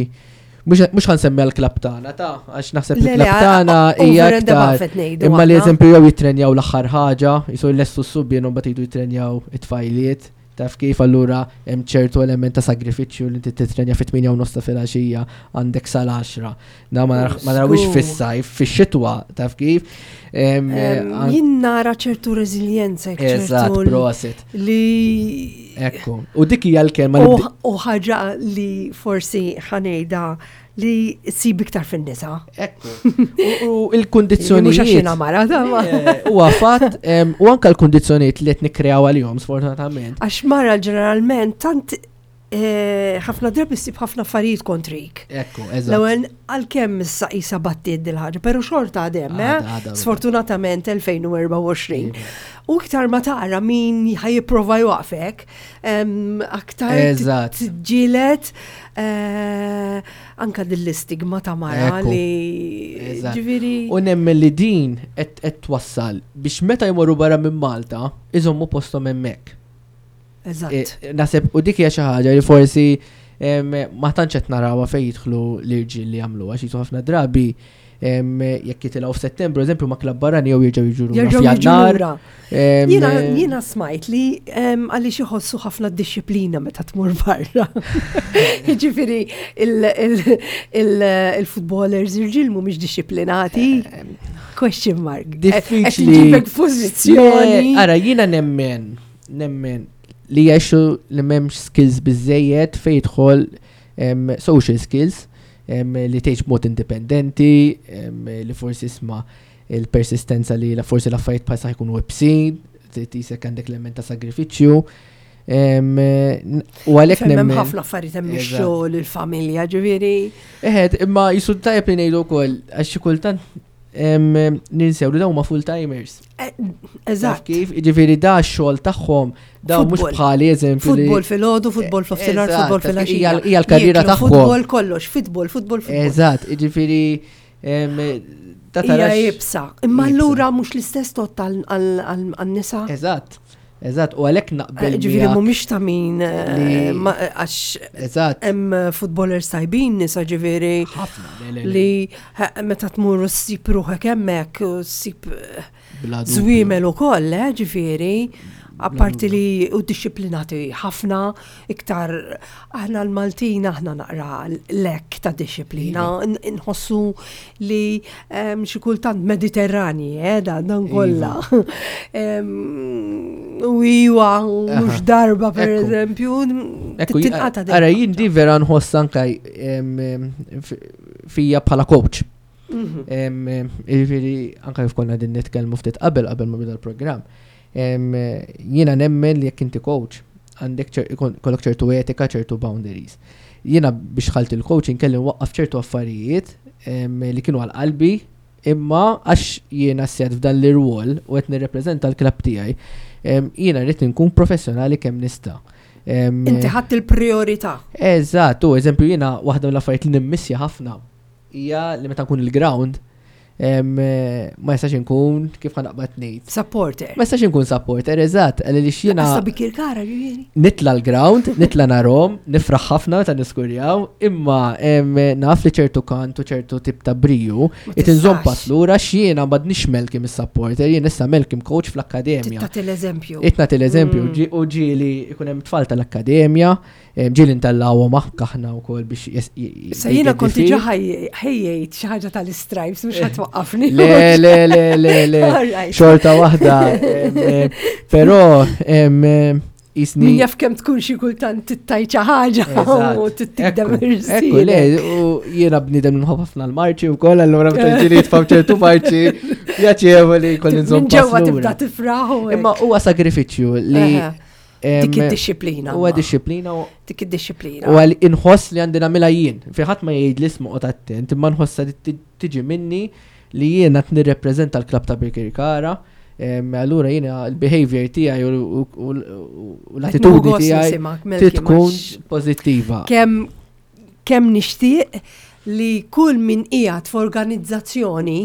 mhux mhux ħa nsemmi għall-klab tagħna ta' għax naħseb li
Le, le,
l-klab tagħna hija
over and
aktar
above qed ngħidu
imma li
aħna.
eżempju jew jitrenjaw l-aħħar ħaġa, jisu l-lestu s-subien u mbagħad jridu jitrenjaw it-tfajliet. Taf kif, allura hemm ċertu element ta' sagrifiċċju li inti titrenja fit-tmienja u nofs ta' filgħaxija, għandek sal-għaxra. Da ma nar- ma narawix
Żgur.
fis-sajf, fix-xitwa, taf kif? Em,
Em,
an-
Jien nara ċertu reżiljenza,
Eżatt,
ċertu
prosit.
li
Ekku. U dik hija l-kelma li
U
bdi-
u ħaġa li forsi ħa ngħidha li ssib iktar fin-nisa.
Ekku. U- U il-kundizzjonijiet.
Mhux għax jiena mara, da, ma.
Eh, Huwa fatt, em, u anka l-kundizzjonijiet li qed nikkreaw għalihom sfortunatament.
Għax mara ġeneralment tant eh, ħafna drabi ssib ħafna affarijiet kontrik.
Ekku, eżatt.
L-ewwel, għalkemm issa qisha battiet dil-ħaġa, però xorta għadem, eh?
Għada, għada,
Sfortunatament elfejn u erbgħa u għoxrin. U iktar ma tara min ħa jipprova jwaqfek, em, aktar
Eżatt.
tġilet eh, anka dill-istigma ta' mara
Ekku.
li
Eżatt.
ġifieri.
U nemmen li din qed qed twassal biex meta jmorru barra minn Malta, iżommu posthom hemmhekk.
Eżatt.
Eh, Naħseb u dik hija xi ħaġa li forsi em, ma tantx qed narawha fejn jidħlu l-irġiel li jagħmlu, għax jisu ħafna drabi em, jekk jitilgħu f'Settembru eżempju ma' klabb barrani jew jerġgħu jiġu lura
Jerġgħu jiġu
f'Jannar.
lura.
Em,
Jiena jiena smajt li em, għaliex iħossu ħafna disċiplina meta tmur barra. Jiġifieri il-footballers irġiel mhumiex dixxiplinati. Question mark.
Diffiċli.
Qed inġibek pożizzjoni.
Le, ara, jiena nemmen, nemmen li jgħixu li m'hemmx skills biżejjed fejn jidħol em, social skills, em, li tgħix b'mod indipendenti, em, li forsi isma' il-persistenza li la forsi l-affarijiet bħal jkunu iebsin, tisek għandek l-element ta' sagrifiċċju. Em, n- U għalhekk
Hemm
nemmen.
ħafna affarijiet, hemm
Eżatt.
ix-xogħol, il-familja, ġifieri.
Eħed, imma jisu tajjeb li ngħidu wkoll għax xi kultant em, ninsew li dawn huma full-timers.
Eh,
Taf
Eżatt.
kif? Ġifieri da x-xogħol tagħhom, da mhux
Futbol.
bħali eżempju li.
Futbol filgħodu, futbol f'nofsinhar,
Eżatt,
futbol
taf kif?
filgħaxija.
Hija hija l-karriera
Jieklu
tagħhom.
Futbol kollox, futbol, futbol, futbol.
Eżatt, ġifieri em, da
Hija
tarax.
iebsa. Imma
Iebsa.
allura mhux l-istess tot għan-nisa.
Eżatt. Eżatt, u għalhekk naqbel.
Ġifieri mhumiex ta' min eh, għax
Eżatt.
Hemm futbolers tajbin nisa, ġifieri li meta tmur ssib ruħek hemmhekk u ssib żwiemel ukoll, eh, ġifieri apparti li u disciplinati ħafna, iktar aħna l-Maltin aħna naqra lack ta' disciplina, iva. nħossu li xi kultant Mediterrani, eh, da dan kollha. Iva. U iwa, mhux darba per eżempju,
tinqata. Ara, jien di vera nħoss anka fija bħala coach. Mhm. Jiġifieri, anka kif konna din nitkellmu ftit qabel qabel ma bida l-programm. Jiena nemmen li jekk inti coach, għandek kollok ċertu etika, ċertu boundaries. Jiena biex dħalt il-coaching kelli waqqaf ċertu affarijiet li kienu għal qalbi, imma għax jiena sed f'dan l-irwol u qed nirrepreżenta l-klabb tiegħi, jiena rrid nkun professjonali kemm nista'.
Inti ħadd il-priorità.
Eżatt, u eżempju jiena waħda mill-affarijiet li nimmissja ħafna hija li meta nkun il-ground ma jistax inkun, kif ħa naqbad ngħid.
Supporter.
Ma jistax inkun supporter, eżatt, għalli jiena.
Issa Birkirkara, ġifieri.
Nitla l-ground, nitla narahom, nifraħ ħafna meta niskurjaw, imma naf li ċertu kantu, ċertu tip ta' briju, it inżomm pass lura x'jiena m'għadnix Malcolm is-supporter, jien issa Malcolm coach fl-akkademja.
Tagħti l-eżempju.
Itnat l-eżempju, mm. u ġieli ikun hemm tfal tal-akkademja, ġieli ntellgħuhom aħna wkoll biex.
Sa jiena kont diġà ħejjejt xi ħaġa tal-Stripes, mhux ħa twaqqafni.
Le, le, le, le, le. Xorta waħda. Però jisni.
Min jaf kemm tkun xi kultant tittajt xi ħaġa u tittikdem.
Ekku, le, u jiena bniedem nħobb ħafna l-marċi wkoll, allura meta ġieli jitfaw ċertu marċi, pjaċevoli kolli nżomm.
Minn ġewwa tibda tifraħ.
Imma huwa sagrifiċċju li
Dik id-disciplina.
Huwa disciplina.
Dik id-disciplina.
U għal inħoss li għandi nagħmilha jien. Fi ħadd ma jgħid li ismu qgħod attent, imma nħossa tiġi minni li jiena qed nirrepreżenta l-klabb ta' Birkirkara. Allura jiena l-behavior tiegħi u l-attitudni tiegħi tkun pożittiva.
Kemm kemm nixtieq li kull min qiegħed f'organizzazzjoni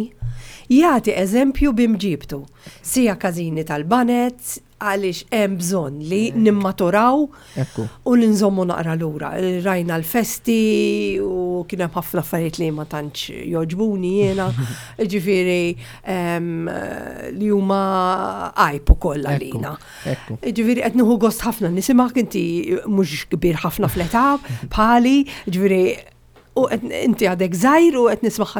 jagħti eżempju b'imġibtu. Sija każini tal-baned, għaliex hemm bżonn li nimmaturaw u li nżommu naqra lura. Rajna l-festi u kien hemm ħafna affarijiet li ma tantx joġbuni jiena, ġifieri li huma għajb ukoll għalina. Ġifieri qed nieħu gost ħafna nisimgħek, inti mhux kbir ħafna fl-età bħali, ġifieri u inti għadek żgħir u qed nisma'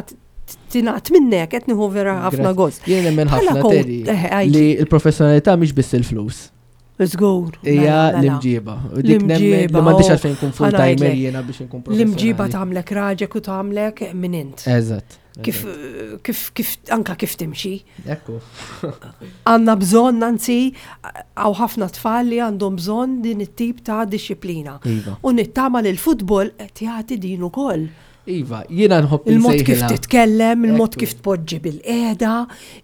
tingħad minnek, qed nieħu vera ħafna gost.
Jien nemmen ħafna, Terry, eh, li l-professjonalità mhix biss il-flus.
Żgur.
Hija
mela, mela.
l-imġiba. U dik nemmen li
L-imġiba,
m'għandix
oh,
għalfejn nkun full timer jiena biex nkun
L-imġiba
professjonali.
tagħmlek raġek u tagħmlek min int.
Eżatt.
Kif, kif, kif, anka kif timxi.
Ekku.
Għandna bżonn, anzi, hawn ħafna tfal li għandhom bżonn din it-tip ta' disciplina.
Iva.
U nittama li l-futbol qed jagħti din ukoll.
Iva, jiena nħobb
Il-mod kif
insejħilha.
titkellem, il-mod
Ekku.
kif tpoġġi bil-qiegħda,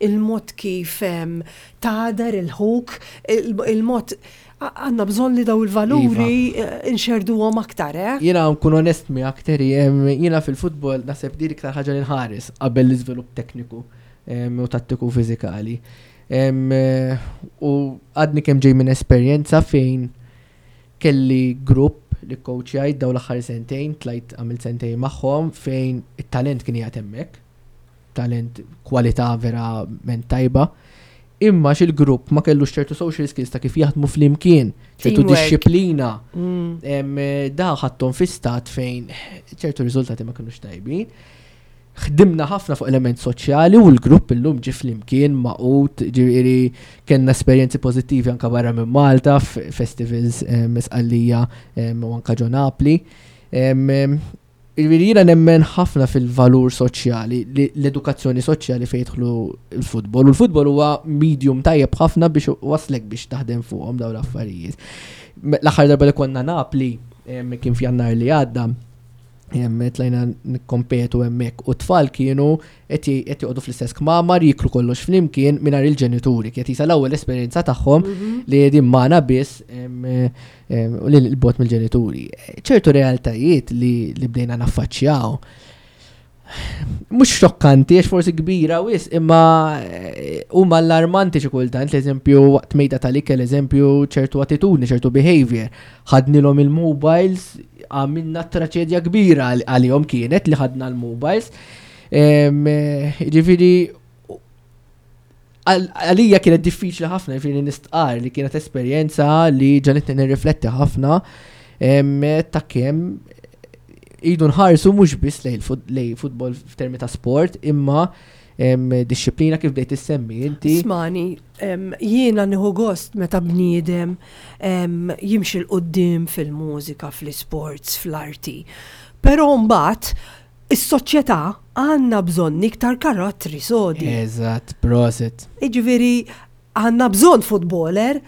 il-mod kif em, tagħder il-ħuk, il- il-mod għandna bżonn li daw il-valuri
Iva.
eh, nxerduhom aktar, eh?
Jiena nkun onest miegħek, Terry, em, jiena fil-futbol naħseb di iktar ħaġa li nħares qabel l-iżvilupp tekniku em, u tattiku fiżikali. Em, eh, U għadni kemm ġej minn esperjenza fejn kelli grupp li coachjajt daw l-aħħar sentejn, tlajt għamilt sentejn magħhom fejn it-talent kien qiegħed hemmhekk, talent, kwalità verament tajba. Imma xil-grupp ma kellux ċertu social skills ta' kif jaħdmu flimkien, ċertu
Teamwork.
disċiplina.
Mm.
Em, eh, Da ħadthom fi stat fejn ċertu riżultati ma kienux tajbin. Ħdimna ħafna fuq element soċjali u l-grupp illum ġi flimkien magħqud, ġifieri kellna esperjenzi pożittivi anka barra minn Malta, festivals Sqallija u anka ġo Napli. Em, em, Ġifieri jiena nemmen ħafna fil-valur soċjali, li l-edukazzjoni soċjali fejn jidħlu l-futbol. U l-futbol huwa medium tajjeb ħafna biex waslek biex taħdem fuqhom dawn l-affarijiet. Me- L-aħħar darba li konna Napli, em, kien f'Jannar li għadda, em, tlajna nikkompetu hemmhekk u tfal kienu qed j- qed joqogħdu fl-istess kmamar, jiklu kollox flimkien mingħajr il-ġenituri. Kienet jisa l-ewwel esperjenza tagħhom
Mhm.
li qegħdin magħna biss em, em, u li l-bot mill-ġenituri. Ċertu realtajiet li, li bdejna naffaċċjaw. Mhux xokkanti, għax forsi kbira wisq, imma eh, huma allarmanti xi kultant, l-eżempju waqt mejda tal-ikel, eżempju ċertu attitudni, ċertu behavior. Ħadnilhom il-mobiles, għamilna traċedja kbira għal- għalihom kienet li ħadna l-mobiles. Em, eh, Ġifieri, għal- għalija kienet diffiċli ħafna, ġifieri nistqar li kienet esperjenza li ġagħlitni nirrifletti ħafna em, ta' kemm idu nħarsu mhux biss lejn il-fut- lejn futbol f'termi ta' sport, imma em, dixxiplina kif bdejt issemmi inti.
Ismagħni, em, jiena nieħu gost meta bniedem em, jimxi 'l quddiem fil-mużika, fl-sports, fl-arti. Però mbagħad is-soċjetà għandna bżonn iktar karattri sodi.
Eżatt, prosit.
Iġifieri għandna bżonn futboler,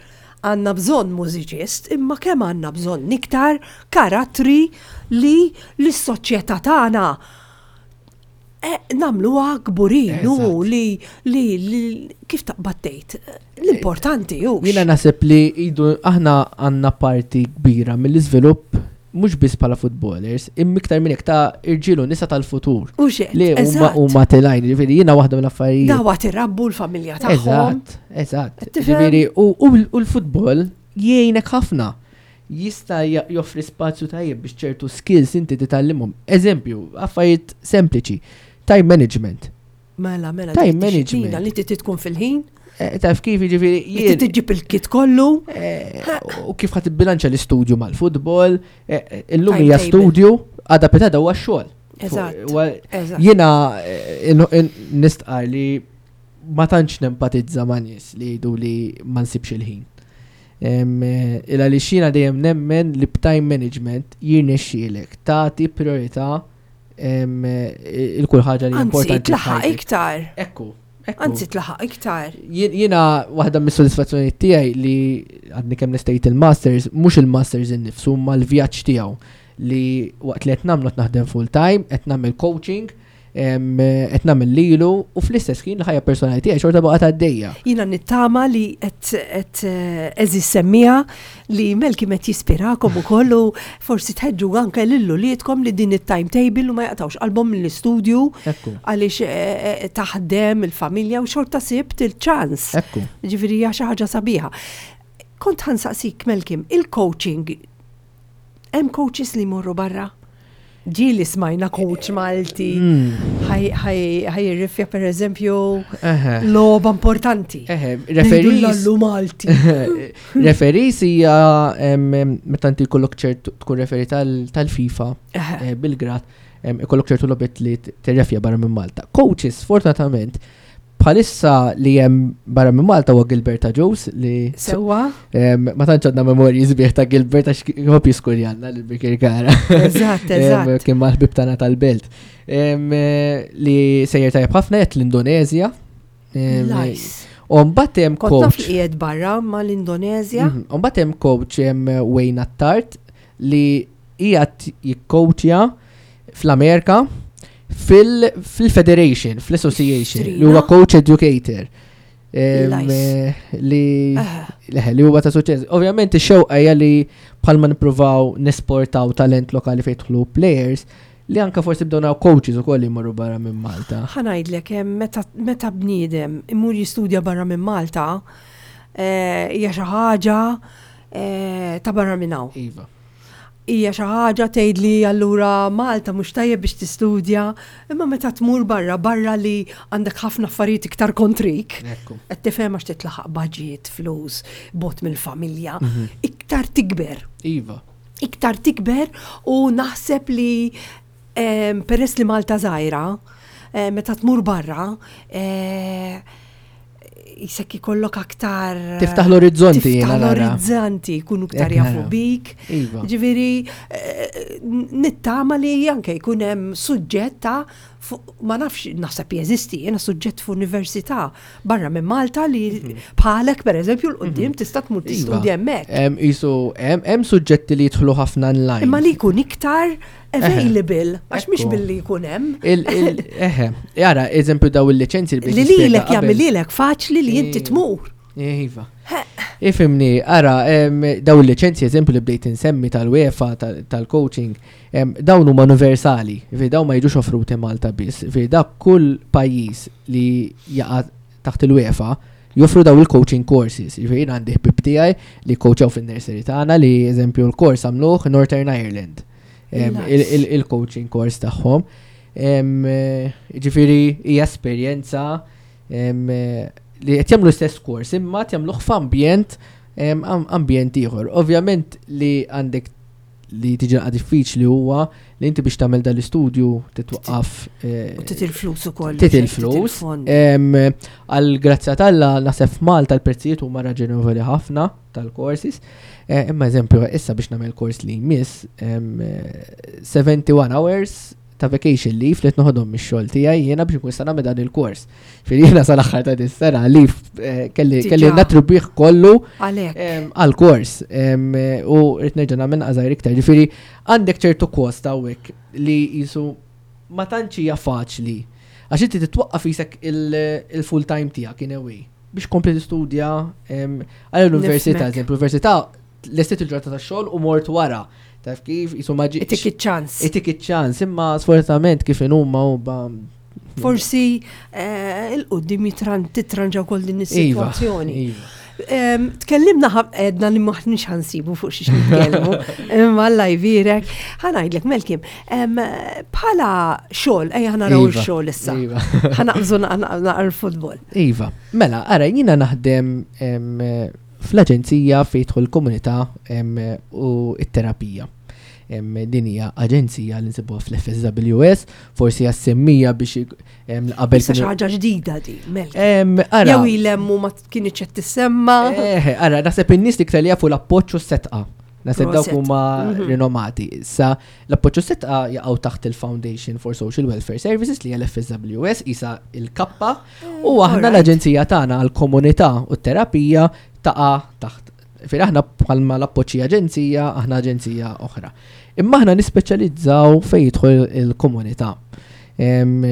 għandna bżonn mużiċist, imma kemm għandna bżonn iktar karattri li l-soċjetà tagħna eh, nagħmluha kburin, u
Eżatt.
li, li, li kif taqbad tgħid, l-importanti hux.
Jiena naħseb li idu aħna għandna parti kbira mill-iżvilupp mhux biss bħala footballers, imma iktar minn hekk ta' irġiel u nisa tal-futur.
U xed,
Li huma
eżatt.
huma telgħin, ġifieri jiena waħda mill-affarijiet.
Dawa tirabbu l-familja tagħhom.
Eżatt, eżatt.
Qed tifhem?
Ġifieri u u u l-futbol jgħinek ħafna. Jista' ja- joffri spazju tajjeb biex ċertu skills inti titgħallimhom. Eżempju, affarijiet sempliċi. Time management.
Mela, mela,
Time
dik dixxiplina
management.
li trid tkun fil-ħin,
Eh, Taf kif ġifieri
li
jien
tiġib il-kit kollu.
Eh, u kif ħa tibbilanċa l-istudju mal-futbol, eh, eh, illum hija
Timetable.
studju, għada pitgħada huwa xogħol.
Eżatt,
Huwa-
eżatt.
Jiena eh, in- in- nistqar li ma tantx nempatizza ma' nies li jgħidu li ma nsibx il-ħin. Em, eh, Illa li xina dejjem nemmen li b'time management jirnexxielek tagħti priorità em, eh, il kull ħaġa li
Anzi,
importanti.
tlaħaq
f'ħajtek.
iktar.
Ekku, ekku.
Anzi, tlaħaq iktar.
Jien- Jiena waħda mis-sodisfazzjoni tiegħi li għadni kemm lestejt il-masters, mhux il-masters innifsu, ma l-vjaġġ tiegħu li waqt li qed nagħmlu qed naħdem full time, qed nagħmel coaching, em, qed nagħmel lilu u fl-istess ħin l-ħajja personali tiegħi xorta baqgħet għaddejja.
Jiena nittama li qed qed eh, eżis semmija li Melki qed jispirakom ukoll u forsi tħeġġu anke lil uliedkom li din it-timetable u ma jaqtawx qalbhom mill-istudju
Ekku,
għaliex eh, eh, taħdem il-familja u xorta sibt il-ċans.
ekku.
Ġifieri hija xi ħaġa sabiħa. Kont ħa nsaqsik Melkim, il-coaching, hemm coaches li jmorru barra? Ġieli smajna coach Malti,
Mm.
ħa jirrifja per eżempju
Eħe.
logħba importanti.
Eħe,
Ngħidu
referees.
l-allu Malti.
Referees hija em, em, meta inti jkollok ċertu tkun referee tal- tal-FIFA
Eħe.
eh, bil-grad em, ikollok ċertu logħbiet li t- tirrefja barra minn Malta. Coaches, fortunatament, bħalissa li hemm barra minn Malta huwa Gilbert Jones li
Sewwa,
em, ma tantx għandna memorji sbieħ ta' Gilbert għax ħobb jiskurjanna lil Birkirkara.
eżatt,
Em,
eżatt.
Kien mal-ħbib tagħna tal-belt. Em, eh, Li sejjer tajjeb ħafna qed l-Indonezja. Em,
Nice.
U mbagħad hemm
Kont naf li
coach.
qiegħed barra mal-Indonezja.
Mhm. U mbagħad hemm coach hemm Wayne Attard li qiegħed jikkoachja fl-Amerika fil-Federation, fl-Association, li huwa
Strina.
coach educator. Em,
Nice.
eh, Li
Eh,
leħe, li huwa ta' suċċess. Ovvjament ix-xewqa hija li bħalma nippruvaw nesportaw talent lokali fejn jidħlu players li anka forsi bdew naraw coaches ukoll li jmorru barra minn Malta.
ħa ngħidlek hemm meta meta bniedem imur jistudja barra minn Malta, eh, hija xi ħaġa eh, ta' barra minn hawn.
Iva.
Hija xi ħaġa tgħid li allura Malta mhux tajjeb biex tistudja, imma meta tmur barra barra li għandek ħafna affarijiet iktar kontrik.
Ekku.
Qed tifhem għax titlaħaq budget, flus, bogħod mill-familja,
Mhm.
iktar tikber.
Iva.
Iktar tikber u naħseb li em, peress li Malta żgħira, eh, meta tmur barra, eh, jisek ikollok aktar.
Tiftaħ l-orizzonti
Tiftaħ
jiena nara.
l-orizzonti, jkunu iktar
Hekk
jafu
nara.
bik.
Iva.
Ġifieri, eh, nittama li anke jkun hemm suġġett ta' fu- ma nafx, naħseb jeżisti, jiena suġġett f'università barra minn Malta li bħalek per eżempju 'l quddiem tista' tmur
Mhm. Iva.
tistudja hemmhekk.
Hemm isu hemm hemm suġġetti li jidħlu ħafna online.
Imma li jkun iktar available, għax mhix
Ekku.
billi jkun hemm.
Il, il, eħe, jara, eżempju daw il-liċenzi
Li lilek jagħmel lilek faċli li inti
Iva.
tmur.
Iva. Ifhimni, ara, em, daw il-liċenzji, eżempju, li bdejt insemmi tal-UEFA, tal- tal-coaching, em, dawn huma universali, fi dawn ma jiġux offruti Malta biss, fi da kull pajjiż li jaqa' taħt il-UEFA joffru daw il-coaching courses. Ġifieri jien għandi ħbib tiegħi li coachaw fin-nursery tagħna li, eżempju, l-kors għamluh Northern Ireland. Em,
Nice.
il- il- Il-coaching course tagħhom. Em, eh, Ġifieri hija esperjenza em, eh, li qed jagħmlu l-istess kors imma qed jagħmluh f'ambjent em, am- ambjent ieħor. Ovvjament li għandek li tiġi naqra diffiċli huwa li inti biex tagħmel dal-istudju titwaqqaf eh,
U trid il-flus ukoll.
Trid il-flus. Em, Għal grazzja t'Alla naħseb f'Malta l-prezzijiet huma raġonevoli ħafna tal-courses. Eh, Imma eżempju, issa biex nagħmel kors li jmiss em, eh, seventy-one hours ta' vacation leave li noħodhom mix-xogħol tiegħi jiena biex nkun nista' nagħmel dan il-kors. Fil jiena sal-aħħar ta' dis-sena leave eh, kelli
Diġà.
kelli nattribwih kollu
Għalek.
em, għal-kors em, eh, u rrid nerġa' nagħmel għażajr iktar. Ġifieri għandek ċertu kost hawnhekk li jisu ma tantx hija faċli. Għax inti titwaqqaf isek il-full time tiegħek in a way biex kompli tistudja em, għal l-università,
Nifhmek.
eżempju, l-università lestiet il-ġurnata tax-xogħol u mort wara. Taf kif jisu ma ġi-
Itik iċ-ċans.
Itik iċ-ċans, imma sfortunatament kif inhuma u ba
Forsi eh, il-qoddim jitran titranġa wkoll din
Iva,
is-sitwazzjoni.
Iva.
Em, Tkellimna ħaf edna li maħniex ħa nsibu fuq xiex nitkellmu, imma Alla jbierek. Ħa ngħidlek, Melkim, em, bħala xogħol, ejja ħa naraw
Iva,
il-xogħol issa.
Iva.
Ħa naqbżu naqra l-futbol.
Iva, mela, ara, jina naħdem em, fl-aġenzija fejn jidħol komunità em, u it-terapija. Em, Din hija aġenzija li nsibuha fl-F S W S, forsi għas-semmija biex em, qabel.
Issa xi
kienu-
ħaġa ġdida di, Melkim.
Em, Ara,
Jew ilem u ma kienx qed tissemma.
Eh, ara, naħseb in-nies iktar li jafu l-Appoġġ u s-Setqa. Naħseb dawk
Proset.
huma
Mhm.
rinomati. Issa l-Appoġġ u s-Setqa jaqgħu taħt il-Foundation for Social Welfare Services li hija l-F S W S, isa il-kappa, u aħna
alright.
l-aġenzija tagħna għall-komunità u t-terapija taqa' taħt. Fir aħna bħalma l-Appoġġi aġenzija, aħna aġenzija oħra. Imma aħna nispeċjalizzaw fejn jidħol il-komunità. Em,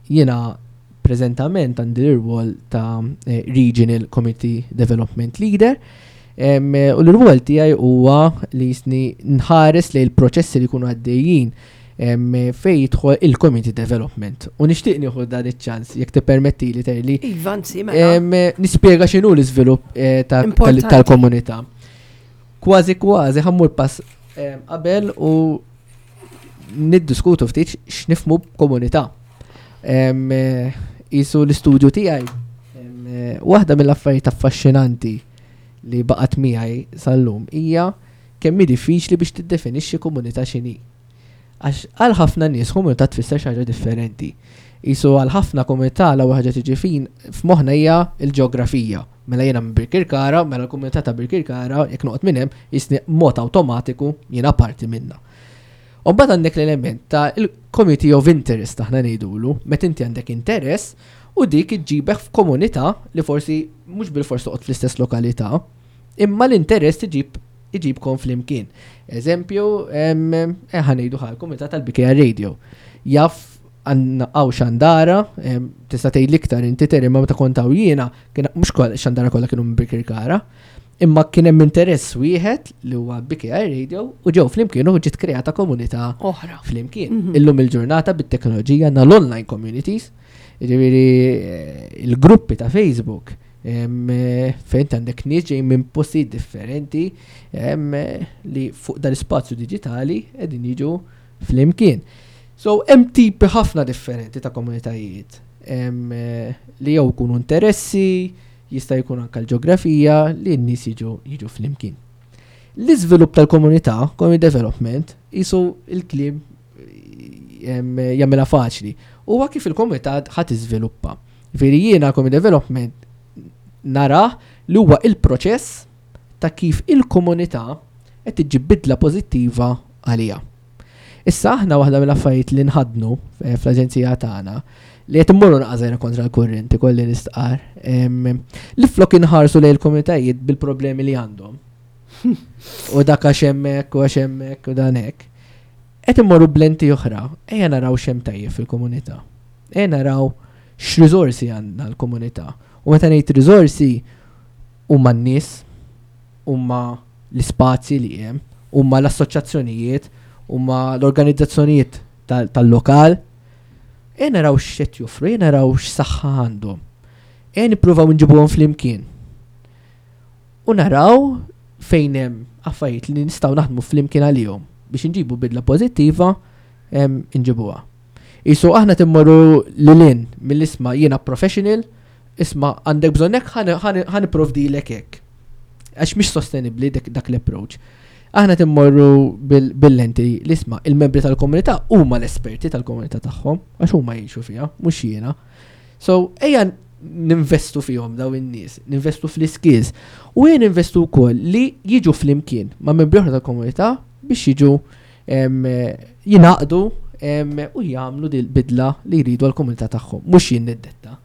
Jiena preżentament għandi l-rwol ta' eh, Regional Community Development Leader. Em, U l-rwol tiegħi huwa li jisni nħares li l-proċessi li jkunu għaddejjin em, fejn jidħol il-community development. U nixtieq nieħu dan iċ-ċans, jekk tippermetti li li
Iva, anzi, mela.
Em, nispjega x'inhu l-iżvilupp eh, ta- tal-
Importanti.
tal-komunità. Kważi kważi ħa mmur pass em, qabel u niddiskutu ftit x'nifhmu b'komunità. Em, eh, Isu l-istudju tiegħi. em, eh, Waħda mill-affarijiet affaxxinanti li baqgħet miegħi sal-lum hija kemm hi diffiċli biex tiddefinixxi komunità x'inhi. Għax għal ħafna nies komunità tfisser xi ħaġa differenti. Isu għal ħafna komunità l-ewwel ħaġa tiġi fin f'moħħna hija l-ġeografija. Mela jiena minn Birkirkara, mela l-komunità ta' Birkirkara, jekk noqgħod minn hemm, jisni mod awtomatiku jiena parti minna. U mbagħad għandek l-element ta' il-community of interest aħna ngħidulu, meta inti għandek interess u dik iġġibek f'komunità li forsi mhux bil-fors toqgħod fl-istess lokalità, imma l-interess iġib iġibkom flimkien. Eżempju, em, eh, ħa ngħidu ħal komunità tal-B K R Radio. Jaf għandna hawn xandara, em, tista' tgħid l-iktar inti teri, ma meta kont hawn jiena, kien mhux kol xandara kollha kienu minn Birkirkara, imma kien hemm interess wieħed li huwa B K R Radio u ġew flimkien u ġiet kreata komunità
Oħra.
flimkien.
Mhm.
Illum il-ġurnata bit-teknoloġija għandna l-online communities, ġifieri eh, il-gruppi ta' Facebook, em, eh, fejn għandek nies ġejjin minn postijiet differenti em, eh, li fuq dal-ispazju diġitali qegħdin jiġu flimkien. So hemm tipi ħafna differenti ta' komunitajiet em, eh, li jew jkunu interessi, jista' jkun anke l-ġeografija li n-nies jiġu jiġu flimkien. L-iżvilupp tal-komunità, community development, jisu il-kliem em, jagħmilha faċli. Huwa kif il-komunità ħa tiżviluppa. Ġifieri jiena community development nara li huwa il-proċess ta' kif il-komunità qed tiġi bidla pożittiva għalija. Issa aħna waħda mill-affarijiet li nħadnu eh, fl-aġenzija tagħna li qed immorru naqżajna kontra l-kurrenti, kolli nistqar, em, li flok inħarsu lejn il-komunitajiet bil-problemi li għandhom. U dak għax hemmhekk u għax hemmhekk u dan hekk. Qed immorru b'lenti oħra, ejja naraw x'hemm tajjeb fil-komunità. Ejja naraw x'riżorsi għandna l-komunità. U meta ngħid riżorsi huma n-nies, Huma l-ispazji li hemm, huma l-assoċjazzjonijiet, huma l-organizzazzjonijiet tal-lokal. Ejja naraw x'qed joffru, ejja naraw x'saħħa għandhom. Ejja nippruvaw nġibuhom flimkien. U naraw fejn hemm affarijiet li nistgħu naħdmu flimkien għalihom biex nġibu bidla pożittiva, nġibuha. Isu aħna timmorru lilin mill-isma jiena professional, isma għandek bżonn hekk, ħa nipprovdilek hekk. Għax mhix sostenibbli dak l-approach. Aħna timmorru bil-lenti l-isma il-membri tal-komunità huma l-esperti tal-komunità tagħhom, għax huma jgħixu fiha, mhux jiena. So ejja ninvestu fihom daw in-nies, ninvestu fl-skills u ejja ninvestu wkoll li jiġu flimkien ma' membri oħra tal-komunità biex jiġu jingħaqdu u jagħmlu dil-bidla li jridu għall-komunità tagħhom, mhux jien niddetta.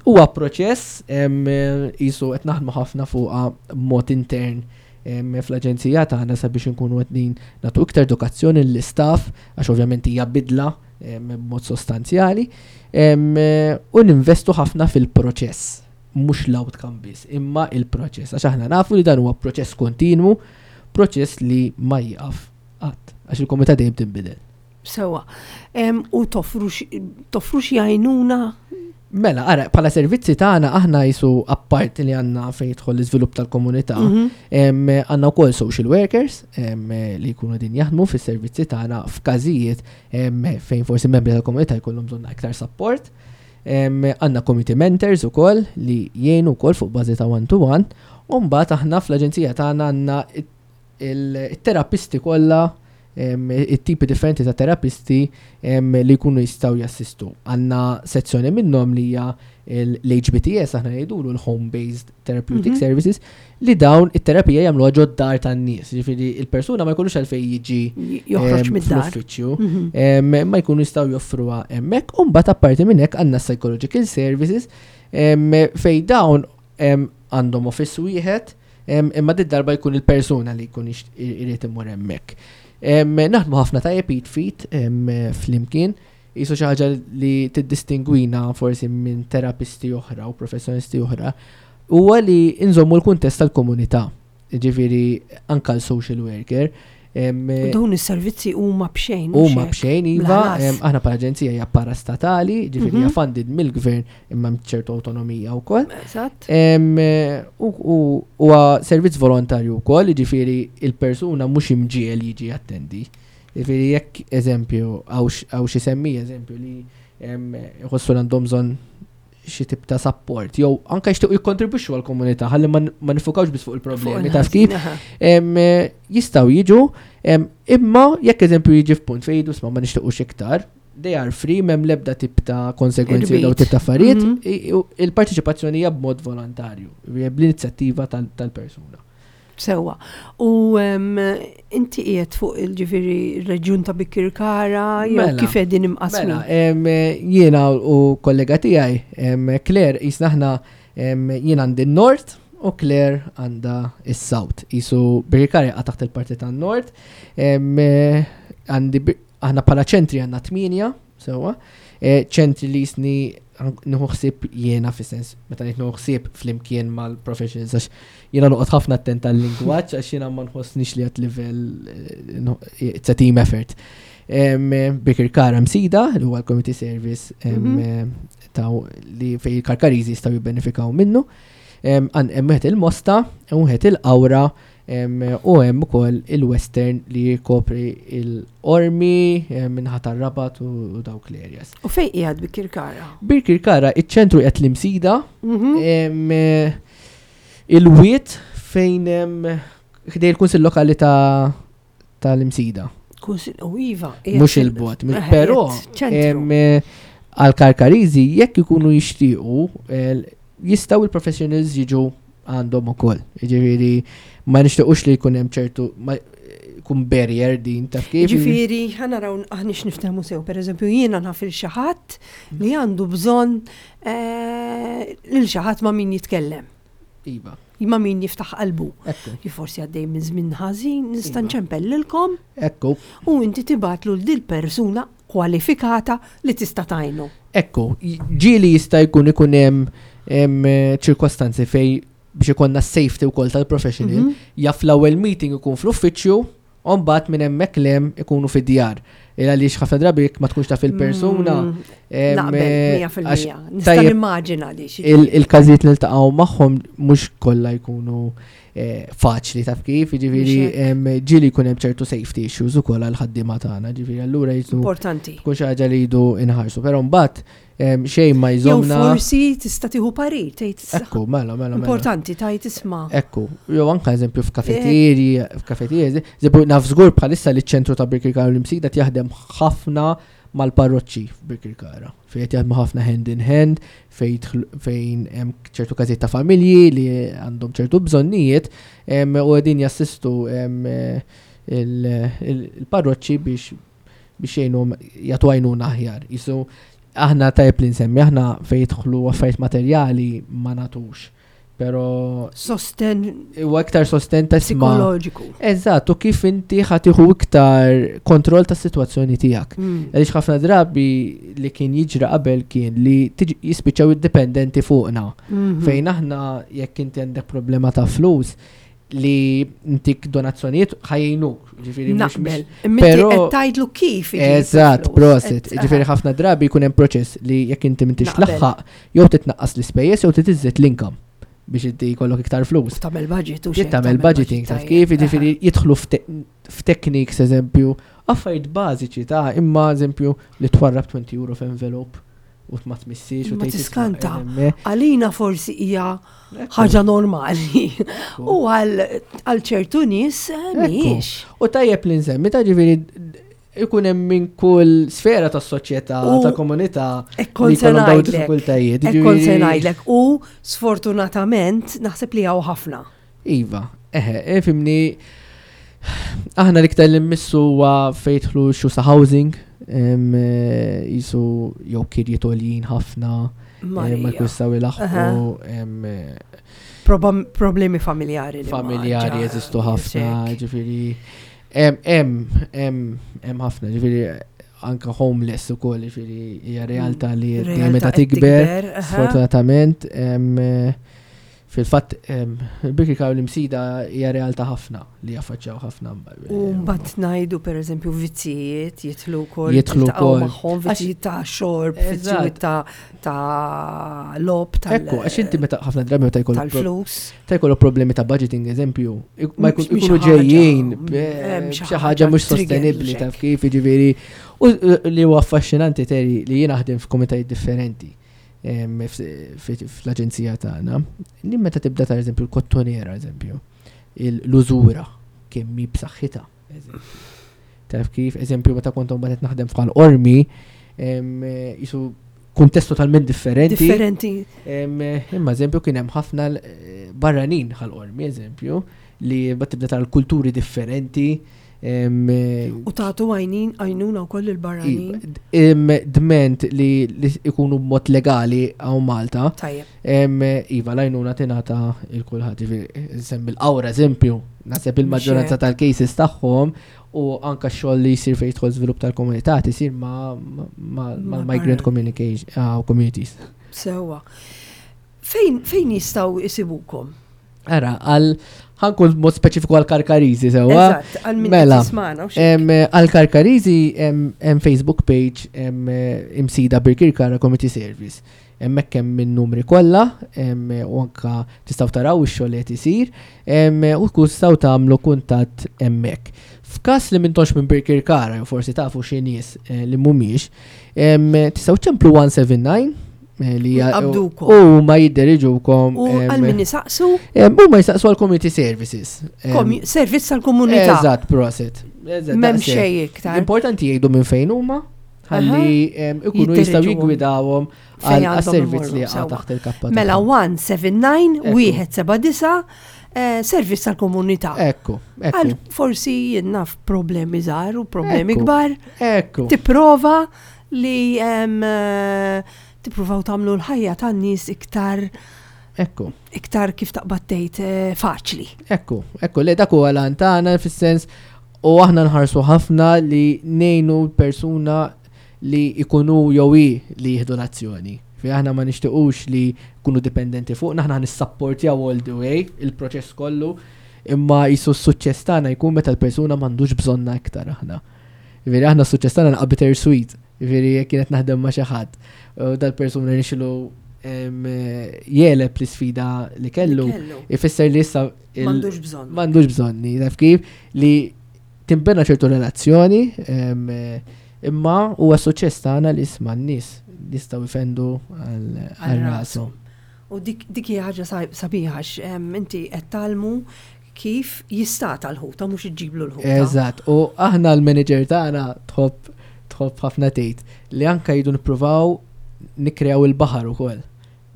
Huwa proċess jisu qed naħdmu ħafna fuqha b'mod intern fl-aġenzija tagħna sabiex inkunu qed nagħtu iktar edukazzjoni lill-istaff, għax ovvjament hija bidla b'mod sostanzjali, u ninvestu ħafna fil-proċess, mhux l-outcome biss, imma il-proċess, għax aħna nafu li dan huwa proċess kontinwu, proċess li ma jieqaf qatt, għax il-komunità dejjem tinbidel.
Sewa. U toffru xi għajnuna?
Mela, ara, bħala servizzi tagħna aħna jisu apart li għandna fejn jidħol l-iżvilupp tal-komunità, mhm. għandna wkoll social workers li jkunu din jaħdmu fis-servizzi tagħna f'każijiet fejn forsi membri tal-komunità jkollhom bżonn aktar support. Għandna community mentors ukoll li jgħinu wkoll fuq bażi ta' one to one, u mbagħad aħna fl-aġenzija tagħna għandna il-terapisti kollha, it-tipi differenti ta' terapisti li jkunu jistgħu jassistu. Għandna sezzjoni minnhom li hija l-H B T S, aħna ngħidulu l-Home Based Therapeutic mhm. Services, li dawn it-terapija jagħmluha ġod-dar tan-nies. Ġifieri il-persuna ma jkunux għalfejn jiġi
joħroġ mid-dar.
Fl-uffiċċju, mhm. ma jkunu jistgħu joffruha hemmhekk. U mbagħad apparti minn hekk għandna psychological services fejn dawn għandhom office wieħed, imma did darba jkun il-persuna li jkun irid imur hemmhekk. Naħdmu ħafna tajjeb id f'id flimkien, jisu xi ħaġa li tiddistingwina forsi minn terapisti oħra u professjonisti oħra, huwa li nżommu l-kuntest tal-komunità. Ġifieri anka l-social worker.
Dawn is-servizzi huma b'xejn.
Huma b'xejn, iva, aħna bħala aġenzija hija parastatali, ġifieri hija mhm. funded mill-gvern imma ċertu autonomija wkoll.
Eżatt.
Huwa servizz volontarju wkoll, ġifieri il-persuna mhux imġiegħel jiġi attendi. Ġifieri jekk eżempju hawn xi semmi eżempju li jħossu għandhom bżonn xi tip ta' support jew anke jixtiequ jikkontribwixxu għall-komunità ħalli ma nifukawx biss fuq il-problemi, taf kif, jistgħu jiġu, imma jekk eżempju jiġi f'punt fejn jgħidu ma nixtiequx iktar, they are free, m'hemm l-ebda tip ta' konsegwenzi jew tip ta' affarijiet, mhm. il-parteċipazzjoni hija b'mod volontarju, bl-inizjattiva tal-persuna.
Sewa. U inti qiegħed fuq il-ġifieri reġjun ta' Bikirkara, jew mela, kif qegħdin imqasmin?
Mela, jiena u kollega tiegħi, Claire, jisna aħna jien għandi n-Nord u Claire għandha is-South. Jisu Birkirkara jaqa' taħt il-parti tan-Nord. Għandi aħna bħala ċentri għandna tmienja, sewa. E, ċentri li jisni nieħu ħsieb jiena, fis-sens meta ngħid nieħu ħsieb flimkien mal-professionals, għax jiena noqgħod ħafna attent tal-lingwaġġ, għax jiena ma nħossnix li għat livell, eh, it's a team effort. Birkirkara, Msida, li huwa l-community service mhm. ta' li fej il-Karkariżi jistgħu jibbenefikaw minnu. Hemm wieħed il-Mosta, wieħed il-Qawra, u hemm ukoll il-Western li jkopri il-Qormi, min-naħa tar-Rabat u dawk l-areas.
U fejn qiegħed Birkirkara?
Birkirkara, iċ-ċentru qiegħed l-Imsida, mhm. il-wied fejn ħdejn il-Kunsill Lokali ta' tal-Imsida.
Kunsill, u iva.
Mhux il-bogħod, però għal Karkariżi jekk ikunu jixtiequ jistgħu il-professionals jiġu għandhom ukoll. Ġifieri ma nixtiequx li jkun hemm ċertu kun barrier din, taf kif.
Ġifieri ħa naraw aħniex niftehmu sew, per eżempju jiena naf il xi ħadd li għandu bżonn eh, lil xi ħadd ma' min jitkellem.
Iva.
Ma' min jiftaħ qalbu.
Ekku.
Forsi għaddej minn żmien ħażin, nista'
Iva.
nċempellilkom
Ekku.
u inti tibgħatlu lil dil persuna kwalifikata li tista' tgħinu.
Ekku, ġieli jista' jkun ikun hemm hemm ċirkostanzi fej biex ikollna safety wkoll tal-professional,
Mhm.
jaf l-ewwel meeting ikun fl-uffiċċju, u mbagħad minn hemmhekk 'l hemm ikunu fid-djar. Il għaliex ħafna drabi jekk ma tkunx taf il-persuna.
Mm,
em,
Naqbel,
eh,
mija fil-mija.
għax
Nista'
tajjeb
nimmaġina li xi.
il- Il-każijiet li niltaqgħu magħhom mhux kollha jkunu eh, faċli, taf kif, jiġifieri
Mhux hekk.
em, ġieli jkun hemm ċertu safety issues ukoll għal ħaddiema tagħna, ġifieri allura jisu
Importanti.
tkun xi ħaġa li jridu inħarsu, però mbagħad em, xejn ma
Jew
jżomna.
forsi tista' tieħu parir, tgħid
Ekku, mela, mela, mela.
Importanti tgħid isma'.
Ekku, jew anka eżempju f'kafettieri, f'kafettieri, eżempju naf żgur bħalissa li ċ-ċentru ta' Birkirkara u l-Imsida jaħdem ħafna mal-parroċċi f'Birkirkara. Fejn qed jaħdmu ħafna hand in hand, fejn jidħlu- fejn hemm ċertu każijiet ta' familji li għandhom ċertu bżonnijiet em, u qegħdin jassistu em, eh, il- il- il-parroċċi biex biex jgħinhom jagħtu għajnuna aħjar. Jisu aħna tajb li nsemmi, aħna fejn jidħlu affarijiet materjali ma nagħtux. Pero
Sosten
huwa iktar sosten ta' isma'.
psikoloġiku.
Eżatt, u kif inti ħa tieħu iktar kontroll tas situazzjoni tiegħek.
Mm.
Għaliex ħafna drabi li kien jiġri qabel kien li tiġi jispiċċaw id-dipendenti fuqna.
Mhm.
Fejn aħna jekk inti għandek problema ta' flus li intik donazzjonijiet ħa jgħinuk. Ġifieri mhux-
Naqbel. Imma inti
Però-
qed tgħidlu kif iġib
Eżatt,
il-flus.
prosit.
Qed-
Ġifieri ħafna drabi jkun hemm proċess li jekk inti m'intix
Naqbel.
laħħaq jew titnaqqas l-ispejjeż jew titiżżid l-income biex inti jkollok iktar flus.
Tagħmel budget u
Jien tagħmel budgeting, taf kif, jiġifieri jidħlu f'te- f'techniques eżempju, affarijiet bażiċi ta' imma eżempju li twarrab għoxrin euro f'envelope u ma tmissix u
Ma
tgħid isma'
tiskanta.
eżemme.
Għalina forsi hija
Ekku,
ħaġa normali.
ekku.
U għal għal ċertu nies eh,
Ekku.
mhijiex.
U tajjeb li nsemmi ta' ġifieri ikun hemm minn kull sfera tas-soċjetà,
U
ta' komunità
Ekkon
li
se
jkollhom dawn
ngħidlek.
diffikultajiet.
Ekkon se
Ġifieri-
ngħidlek. U sfortunatament naħseb li hawn ħafna.
Iva, eħe, eh, fimni, aħna l-iktar li mmissu huwa fejn jidħlu issues ta' housing, em, eh, jisu jew kirjiet għoljin ħafna, eh, ma
Marija.
jkun jistgħu ilaħħqu, em, eh,
Proba- Problemi familjari. li ma
familjari
ġa-
jeżistu ħafna,
hekk.
ġifieri, hemm hemm hemm hemm ħafna, ġifieri anka homeless ukoll, ġifieri hija realtà li dejjem
Realtà
meta
qed
tikber,
aha.
sfortunatament, em, eh, fil-fatt il-Birkirkara u l-Imsida hija realtà ħafna li jaffaċċjaw ħafna.
U mbagħad ngħidu pereżempju vizzijiet jidħlu wkoll
Jidħlu
tiltaqgħu
wkoll.
magħhom, vizzijiet ta' xorb, vizzijiet ta' ta' logħob tal
Ekku, għax inti meta ħafna drabi meta jkollok pro-
tal-flus.
ta' jkollok problemi ta' budgeting, eżempju, ik- ma jkun-
Mhix
ikunu
ħaġa,
ġejjin
hemm xi
xi ħaġa mhux
trigger
sostenibbli
xek.
taf kif, jiġifieri u li huwa affaxxinanti teri li jien naħdem f'komitajiet differenti em, f- f- fl-aġenzija tagħna. Li meta tibda ta' eżempju l-Kottonera, eżempju, l-użura kemm hi b'saħħitha, eżempju. Taf kif, eżempju, meta kont mbagħad qed naħdem f'Ħal Qormi, em, jisu kuntest totalment differenti.
Differenti.
Em, Imma eżempju kien hemm ħafna l- eh, barranin Ħal Qormi, eżempju, li bat tibda tara l-kulturi differenti. em, eh,
U tagħtu għajnin għajnuna wkoll il-barranin.
em, Dment li li ikunu b'mod legali hawn Malta,
Tajjeb.
em, iva l-għajnuna tingħata lil kulħadd. Ġifieri, nsemmi l-Qawra eżempju, naħseb il-maġġoranza tal-cases tagħhom u anka x-xogħol li jsir fejn jidħol żvilupp tal-komunità tisir ma' ma' ma'
Ma'
migrant
barra.
communication ah, communities.
Sewwa. Fejn fejn jistgħu jisibukom?
Ara, għal ħa nkun mod speċifiku għal Karkariżi sewwa.
Eżatt, għal min
Mela,
qed jismagħna u xi.
Em, Għal Karkariżi hemm hemm Facebook page hemm eh, Imsida Birkirkara Community Service. Hemmhekk hemm in-numri kollha em, u anka tistgħu taraw ix-xogħol li qed isir em, u tkun tistgħu tagħmlu kuntatt hemmhekk. F'każ li m'intomx minn Birkirkara jew forsi tafu xi nies eh, li mhumiex, em, tistgħu ċemplu wieħed seba' disa eh, li hija-
Qabdukom.
u ma jidderiġukom
U
em,
għal min isaqsu
em, Huma jistaqsu għal community services. Em,
komu- servizz tal-komunità.
Eżatt, prosit. Eżatt,
M'hemm
daqshekk.
xejn iktar.
L-importanti jgħidu minn fejn huma, ħalli em, ikunu jistgħu
Jiddiriġuhom.
jiggwidawhom
Fejn
għal
għandhom
servizz li
imorru,
jaqa'
sewwa.
taħt il-kappa.
Mela
tagħhom.
wieħed seba' disa
Ekku.
wieħed seba' disa eh, servizz tal-komunità.
Ekku,
Għal
ekku,
forsi jien naf problemi żgħar u problemi
Ekku.
kbar.
ekku.
Tipprova li em, eh, tippruvaw tagħmlu l-ħajja tan-nies iktar
Ekku,
iktar kif taqbad tgħid eh, faċli.
ekku, ekku, le dak huwa l tagħna fis-sens u aħna nħarsu ħafna li ngħinu l-persuna li ikunu jew hi li jieħdu l-azzjoni. Fi aħna ma nixtiequx li kunu dipendenti fuq, aħna nissapportjaw all the way il-proċess kollu, imma jisu s-suċċess tagħna jkun meta l-persuna m'għandux bżonna iktar aħna. Veri aħna s-suċċess tagħna naqa' bittersweet. Veri jekk kienet naħdem ma' xi ħadd u dal-persuna nixlu jegħleb l-isfida li kellu, ifisser li issa il-
M'għandux bżonn.
M'għandux bżonni, taf kif li timbena ċertu relazzjoni, em, imma huwa suċċess tagħna li isma' n-nies jistgħu jfendu għal għal rashom.
U dik dik hija ħaġa sa- sabiħa għax em, inti qed tgħallmu kif jistata l-ħuta, mhux iġġiblu l-ħuta.
Eżatt, u aħna l-manager tagħna tħobb tħobb ħafna tgħid li anka jridu nippruvaw nikkreaw il-baħar ukoll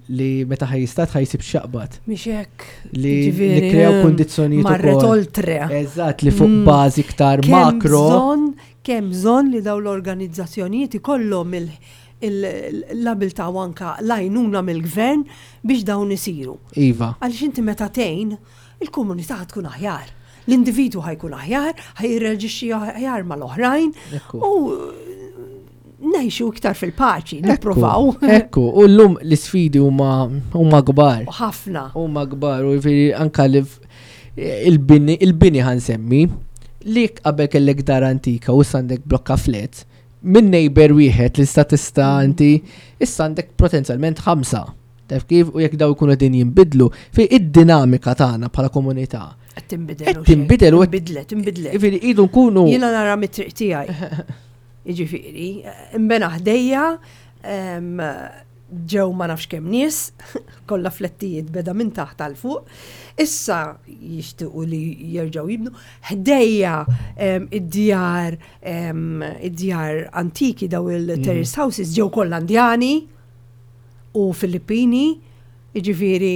li meta ħa jistad ħa jsib x'jaqbad
Mhix hekk.
Li
Ġifieri,
nikkreaw
em,
kundizzjonijiet
Marret
ukoll.
oltre.
Eżatt, li fuq
Mm.
bażi iktar
Kemm
makro.
bżonn, kemm bżonn li daw l-organizzazzjonijiet ikollhom il- il- l-abilità u anka l-għajnuna mill-gvern biex dawn isiru.
Iva.
Għaliex inti meta tgħin, il-komunità tkun aħjar. L-individwu ħa jkun aħjar, ħa jirreaġixxi aħjar mal-oħrajn
Ekku.
u ngħixu iktar fil-paċi, nipprovaw.
Ekku, u llum l-isfidi huma huma kbar.
Ħafna.
Huma kbar u jiġifieri anka li f- il-bini il-bini ħa nsemmi li qabel kellek dar antika u issa għandek blokka flats, minn neighbor wieħed li sta tista' inti issa għandek potenzjalment ħamsa. Taf kif, u jekk daw ikunu din jinbidlu fi id-dinamika tagħna bħala komunità.
Qed tinbidel.
Qed tinbidel u qed-
Inbidlet, inbidlet.
Jiġifieri idu nkunu
Jiena nara mit-triq tiegħi. Jiġifieri, imbena ħdejja, em, ġew ma nafx kemm nies, kollha flettijiet beda minn taħt għal fuq. Issa jixtiequ li jerġgħu jibnu. Ħdejja em, id-djar em, id-djar antiki, daw il-terrace houses, ġew kollha Indjani u Filippini, jiġifieri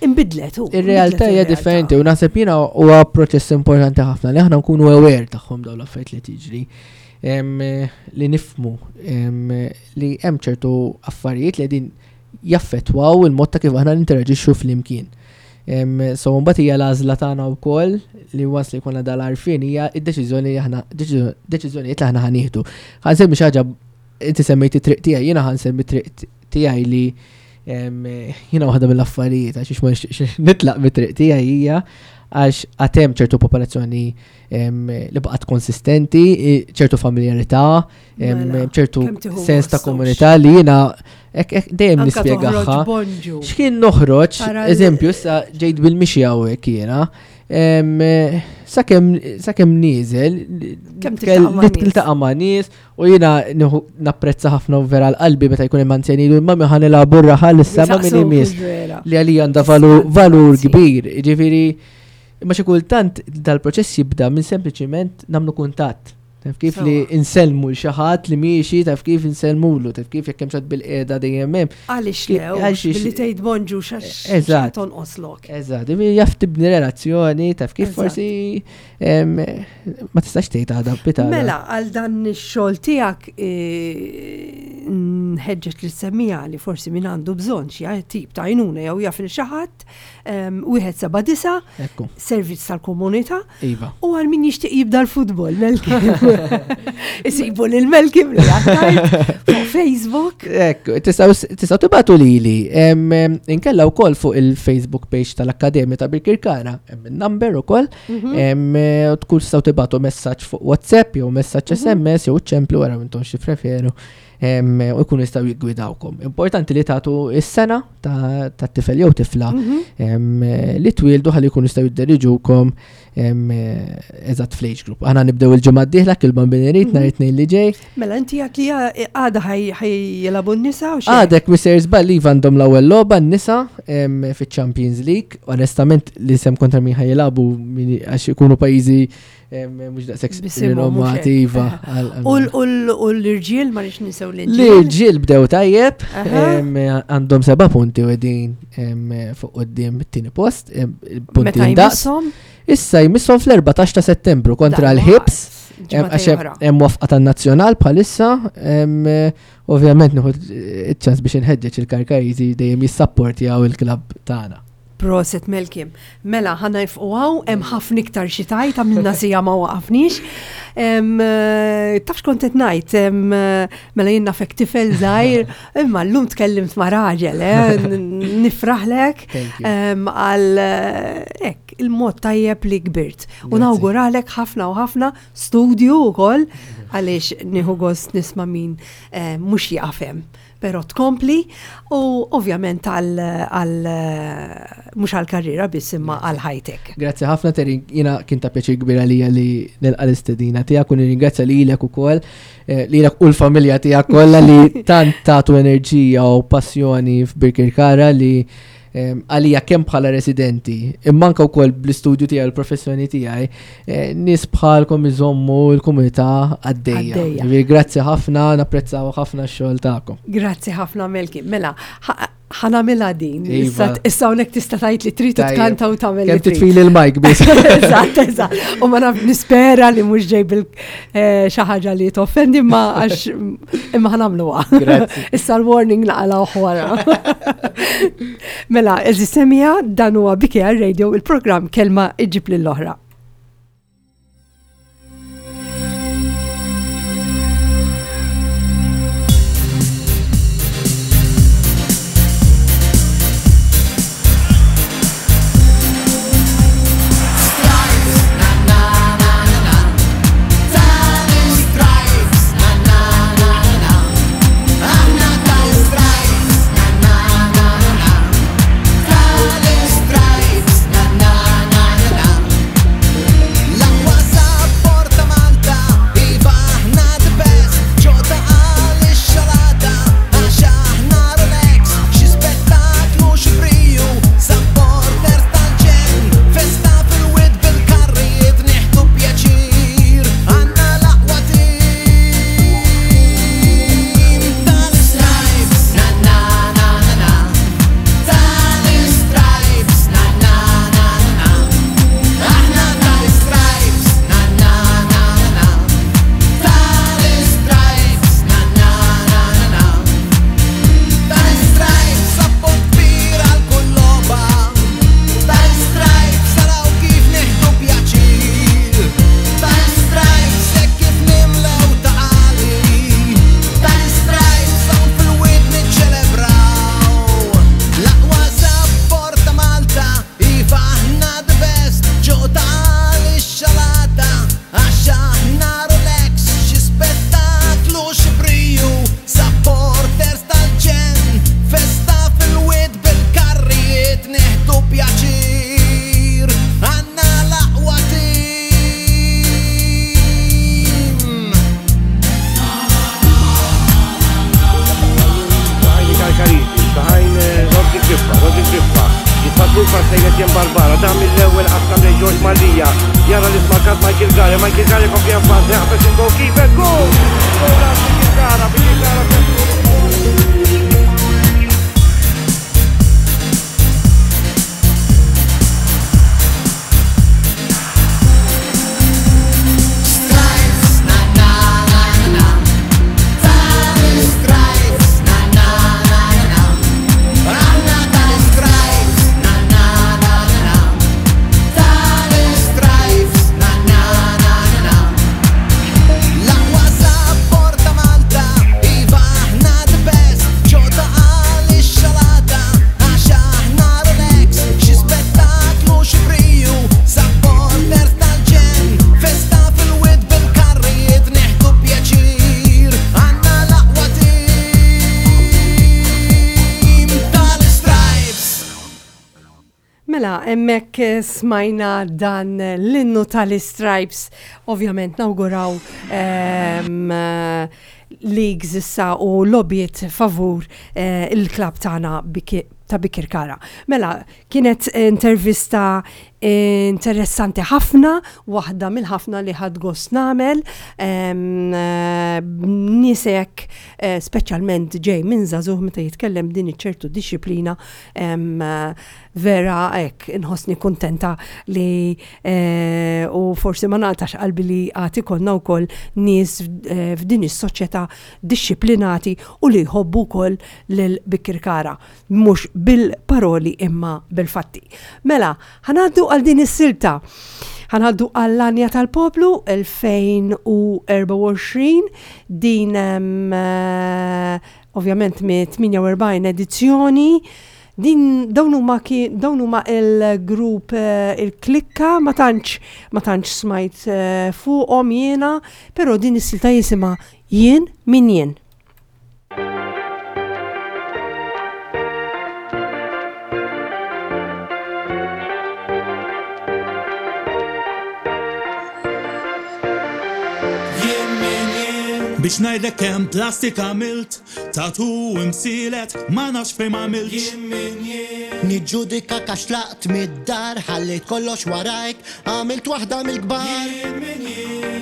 imbidlet hu.
Ir-realtà
Imbidlet
hija
ir-realtà.
differenti u naħseb jiena huwa proċess importanti ħafna li aħna nkunu aware tagħhom dawn l-affarijiet li tiġri. Em, li nifmu em, li hemm ċertu affarijiet li qegħdin jaffettwaw il-mod ta' kif aħna ninteraġixxu flimkien. Em, So mbagħad hija l-għażla tagħna wkoll li once li jkollna dal-għarfien hija id-deċiżjoni li aħna deċiżjonijiet li aħna ħa nieħdu. Ħa nsemmi xi ħaġa, inti semmejti triq tiegħi, jiena ħa nsemmi triq tiegħi li em, jiena waħda mill-affarijiet għax ma nixtieqx nitlaq mit-triq tiegħi hija għax għad hemm ċertu popolazzjoni em, li baqgħet konsistenti, i- ċertu familjarità, em,
Mela,
ċertu
kemm tieħu
sens ta'
gost,
komunità li jiena hekk hekk dejjem
Anka
nispjegaha.
toħroġ bonġu.
X'kien noħroġ,
Tara l-
eżempju, issa ġejt bil-mixi hawnhekk jiena, em, sakemm sakemm nieżel,
Kemm tiltaqa' ma' nies.
tiltaqa' ma' nies u jiena nieħu- napprezza ħafna u vera l-qalbi meta jkun hemm anzjani jgħidu, "Mami, ħa nilagħbu r-raħal issa ma' min
Jisaqsuk
imiss."
vera.
Li għalija għandha valur, valur
Sì.
kbir, ġifieri, imma xi kultant dal-proċess jibda minn sempliċiment nagħmlu kuntatt. Taf kif, li
Sewwa.
insellmu l xi ħadd li miexi, taf kif, insellmulu, taf kif, jekk hemm xi ħadd bil-qiegħda dejjem hemm.
Għaliex
Ki-
le,
għaliex-
billi tgħid bonġu xax
Eżatt.
tonqoslok.
Eżatt, ġifieri jaf tibni relazzjoni, taf kif,
Eżatt.
forsi em, ma tistax tgħid għada pitgħada.
Mela, għal dan ix-xogħol tiegħek eh, nħeġġeġ li semmija li forsi min għandu bżonn xi tip ta' għajnuna jew jaf lil xi ħadd, wieħed seba' disa',
Ekku,
servizz tal-komunità
iva.
u għal min jixtieq jibda l-futbol, Melkim. Isibu lil Melkim li għattajt fuq Facebook.
Ekku, tistgħu tistgħu tibagħtu lili. Em, em, Inkella wkoll fuq il-Facebook page tal-Akkademja ta' Birkirkara, hemm il-number ukoll.
Mhm.
Em, eh, u tkun tistgħu tibagħtu messaġġ fuq WhatsApp jew messaġġ S M S jew ċemplu wara intom xi preferu em, u jkunu jistgħu jiggwidawkom. Importanti li tagħtu is-sena ta' tat-tifel jew tifla
Mhm.
em, eh, li twildu ħalli jkunu jistgħu jidderiġukom em, eh, eżatt fl-age group. Aħna nibdew il-ġimgħa d-dieħla kil-bambin irid nhar it-Tnejn li ġej.
Mela, inti għat li għada ħa jilagħbu n-nisa u xejn?
Għadek Mister Żball, iva, għandhom l-ewwel logħba n-nisa em, fiċ-Champions League. Onestament li sem kontra min ħa jilagħbu min- għax ikunu pajjiżi em, mhux daqshekk
Bisimhom, mhux
rinomati
hekk.
iva. għal-
U l- u l- u l-irġiel, ma rridx ninsew l-irġiel.
L-irġiel bdew tajjeb,
Aha.
em, għandhom seba' punti u qegħdin em, fuq quddiem it-tieni post, em, punti
Meta
indaqs.
jmisshom?
Issa jmisshom fl-erbatax ta' Settembru kontra l-Hibs. Em,
Ġimgħa
Għax
oħra.
hemm waqfa tan-nazzjonal bħalissa, em, eh, ovvjament nieħu iċ-ċans biex inħeġġeġ il-Karkariżi dejjem jissapportjaw il-klabb tagħna.
Prosit, Melkim. Mela, ħa nieqfu hawn, hemm ħafna iktar xi tgħid, għamilna siegħa ma waqafniex. Em, eh, Taf x'kont qed ngħid, em, eh, mela jien nafek tifel żgħir, imma llum tkellimt ma' raġel, eh, n- nifraħlek
Thank you.
em, għal eh, hekk, il-mod tajjeb li kbirt. U
Grazzi.
nawguralek ħafna u ħafna studju wkoll għaliex nieħu gost nisma' min eh, mhux jieqaf hemm. Però tkompli u ovvjament għal għal mhux għal karriera biss imma għal ħajtek.
Grazzi ħafna, Terry, jiena kien ta' pjaċir kbir għalija li nilqa l-istedina tiegħek u nirringrazzja lilek ukoll, eh, lilek u l-familja tiegħek kollha li tant tagħtu enerġija u passjoni f'Birkirkara li em, għalija kemm bħala residenti, imma anke wkoll bl-istudju tiegħi u l-professjoni tiegħi, eh, nies bħalkom iżommu l-komunità għaddejja.
Għaddejja.
Ġifieri grazzi ħafna, napprezzaw ħafna x-xogħol tagħkom.
Grazzi ħafna, Melki. Mela, ħa nagħmilha din.
Iva.
Issa issa hawnhekk tista' tgħid li trid
Tajjeb.
tkanta u tagħmel li
Kemm
trid.
titfili l-mic biss.
Eżatt, eżatt. U ma naf nispera li mhux ġej bil eh, xi ħaġa li toffendi, imma għax imma ħa nagħmluha.
Grazzi.
Issa l-warning naqalgħu wara. Mela, għeżież semmiegħa, dan huwa B K R Radio, il-programm Kelma Iġġib lill-Oħra.
Stripes, na na na na. Aħna tal-Stripes, na na na na. Tal-Stripes, na na na na. L-aqwa support ta' Malta, iva aħna the best. Ġota għal ix-xalata, għax aħna Rolex. Xi spettaklu, xi briju, supporters tal-ġenn. Festa fil-wied bil-karrijiet, nieħdu pjaċir. Għandna l-aqwa team tal-Stripes, na na na na na. Tal-Stripes, na na na na. Aħna tal-Stripes, na na na na. Tal-Stripes, na na na na. Tal-Stripes, support kbir għal kull logħba. Tal-Stripes, araw kif nieħdu pjaċir. Tal-Stripes, hekk kif nimlew Ta' Qali. Tal-Stripes, hawn fil-wied niċċelebraw. L-aqwa support ta' Malta, iva aħna the best. Ġota għal ix-xalata, għax aħna Rolex. Xi spettaklu, xi briju, supporters tal-ġenn. Festa fil-wied bil-karrijiet, nieħdu pjaċir. Għandna l-aqwa team.
Saħajni Kalkariti, saħajn Rodri Griffa, Rodri Griffa, jitfadlu pass lejn Barbara, dan mill-ewwel qassam lejn George Mallia, jara li smarkat Michael Gara, Michael Gara kompli avvanza, jaqbeż il-goalkeeper, goal! Goal għal Michael Gara, Michael Gara.
Stripes, na na na na. Tal-Stripes, na na na na. Aħna tal-Stripes, na na na na. Tal-Stripes, na na na na. L-aqwa support ta' Malta, iva aħna the best. Ġota għal ix-xalata, għax aħna Rolex. Xi spettaklu, xi briju, supporters tal-ġenn. Festa fil-wied bil-karrijiet, nieħdu pjaċir. Għandna l-aqwa team tal-Stripes.
Mela, hemmhekk smajna dan l-innu tal-Stripes, ovvjament nawguraw um, leagues issa u logħbiet favur eh, il-klab tagħna Biki- ta' Bikirkara. Mela, kienet intervista interessanti ħafna, waħda mill-ħafna li ħadt gost nagħmel, em, eh, nisek eh, speċjalment ġej minn żagħżugħ meta jitkellem din iċ-ċertu disciplina em, eh, vera hekk inħossni kuntenta li eh, u forsi ma naqtax qalbi li għad ikollna wkoll nies eh, f'din is-soċjetà dixxiplinati u li jħobbu wkoll lil Birkirkara, mhux bil-paroli imma bil-fatti. Mela, ħa ngħaddu għal din is-silta. Ħa ngħaddu għall-Għanja tal-Poplu elfejn u erbgħa u għoxrin, din em, eh, ovvjament mit-tmienja u erbgħin edizzjoni. Din dawn huma ki- dawn huma il-grupp eh, il-Klikka, ma tantx ma tantx smajt eh, fuqhom jiena, però din is-silta jisimha "Jien Min Jien".
Jien min jien biex ngħidlek kemm plastik għamilt, tatu imsielet, ma nafx fejn m'għamiltx. Jien min jien.
Niġġudika għax tlaqt mid-dar, ħallejt kollox warajk, għamilt waħda mill-kbar.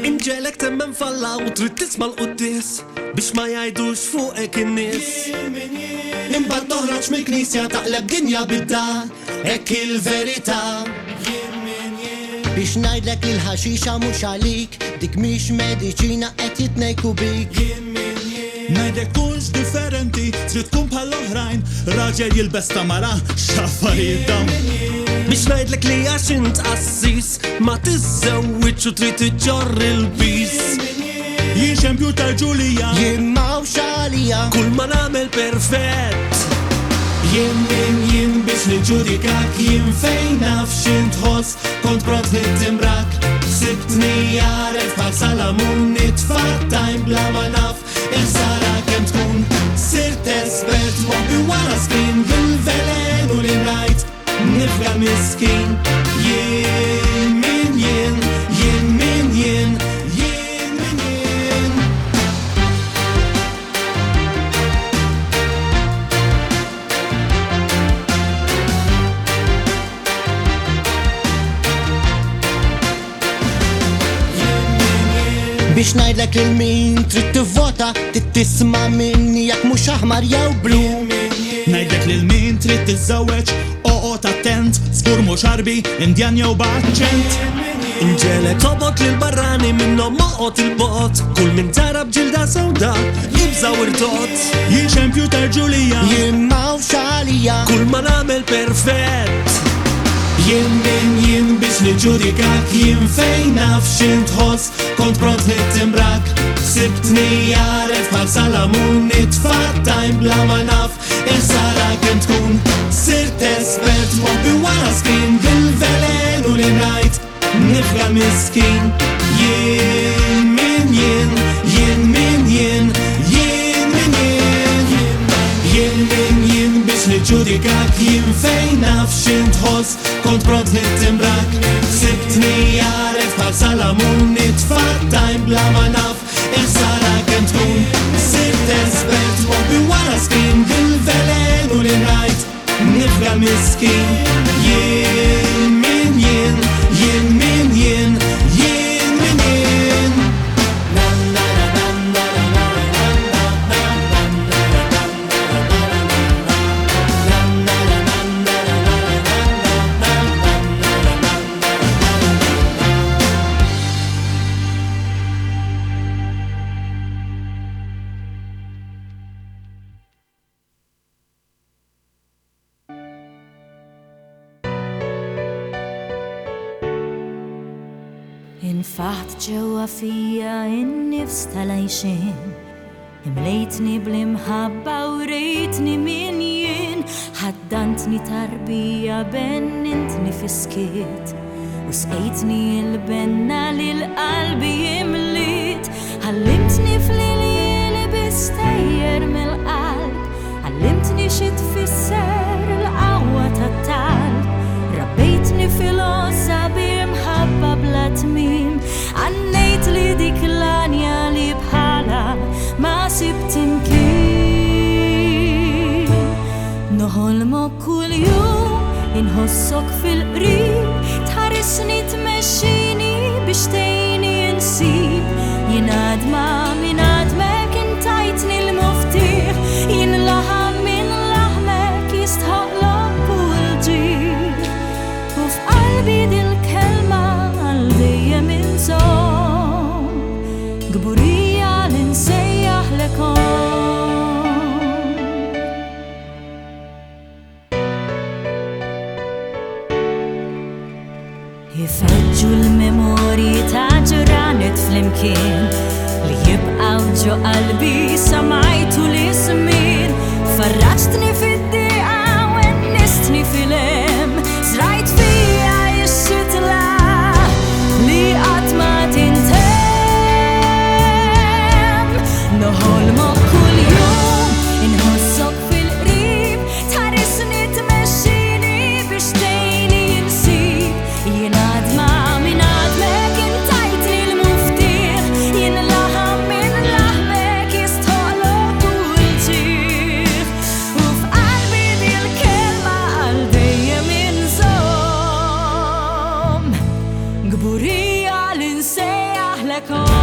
Inġegħlek temmen f'Alla u trid tisma' l-quddies biex ma jgħidux fuqek in-nies.
Imbagħad toħroġ mill-knisja taqleb dinja bidda, hekk il-verità. Biex ngħidlek li l-ħaxixa mhux għalik, dik mhix mediċina, qed jitnejku bik.
Ngħidlek tkunx differenti, trid tkun bħall-oħrajn, raġel jilbes ta' mara, x'affarijiet dawn.
Biex ngħidlek li għax int qassis ma tiżżewwiġ u trid iġġorr il-piż.
Jien xempju tal-Ġulija.
Jien m'hawnx għalija.
Kull ma nagħmel perfett.
Jien min jien biex niġġudikak, jien fejn naf x'int tħoss, kont pront nittimbrak. Sibtni għaref bħal Salamun, nitfa' bla ma naf il-sara kemm tkun. Sirt espert moħbi wara screen bil-velenu li rajt nifga miskin. Jien min jien, jien min jien, jien min jien.
Biex ngħidlek lil min trid tivvota, trid tisma' minni jekk mhux aħmar jew blu.
Ngħidlek lil min trid tiżżewweġ, oqgħod attent, żgur mhux Għarbi, Indjan jew b'aċċent.
Inġegħlek tobgħod lil barrani, minnhom oqgħod 'il bogħod. Kull min tara b'ġilda sewda, ibża' u rtod.
Jien xempju tal-Ġulija.
Jien m'hawnx għalija.
Kull ma nagħmel perfett.
Jien min jien biex niġġudikak, jien fejn naf x'int tħoss, kont pront nittimbrak. Sibtni għaref bħal Salamun, nitfa' bla ma naf il-sara kemm tkun. Sirt espert moħbi wara screen bil-velenu li rajt nifga miskin. Jien min jien, jien min jien, jien min jien. Jien min jien biex niġġudikak, jien fejn naf x'int tħoss, kont pront nittimbrak. Sibtni għaref bħal Salamun, nitfa' bla ma naf il-sara kemm tkun. Sirt espert moħbi wara screen bil-velenu li rajt nifga miskin. Jien min jien, jien min jien, jien min jien. Na na na na na na na na na.
Infaħt ġewwa fija in-nifs tal-għajxien, imlejtni bl-imħabba u rejtni min jien, ħaddantni tarbija, bennintni fis-skiet u sqejtni il-benna li l-qalbi imliet. Għallimtni fl-iljieli bistejjer mill-qalb, għallimtni xi tfisser il-qawwa tat-talb. Rabbejtni fil-għożża b'imħabba bla tmim. Għannejt li dik l-għanja li bħala ma sibt imkien. Noħolmok kull jum, inħossok fil-qrib, tħarisni, tmexxini biex tgħinni insib. Jien għadma minn għadmek, intajtni l-muftieħ, jien laħam minn laħmek, jistħoqqlok kull ġieħ. flimkien li jibqgħu ġo qalbi sa majtu l-ismin. Farraġtni fid-diqa u ennistni fil-hemm, żrajt fija x-xitla li qatt ma tintemm. Noħolmok kuljum, inħossok fil-qrib, tħarisni tmexxini biex tgħinni insib. Jien għadma minn għadmek intajtni l-muftieħ, jien laħam minn laħmek jistħoqlok kull ġieħ. U f'qalbi dil-kelma għal dejjem inżomm, kburija li nsejjaħlek omm.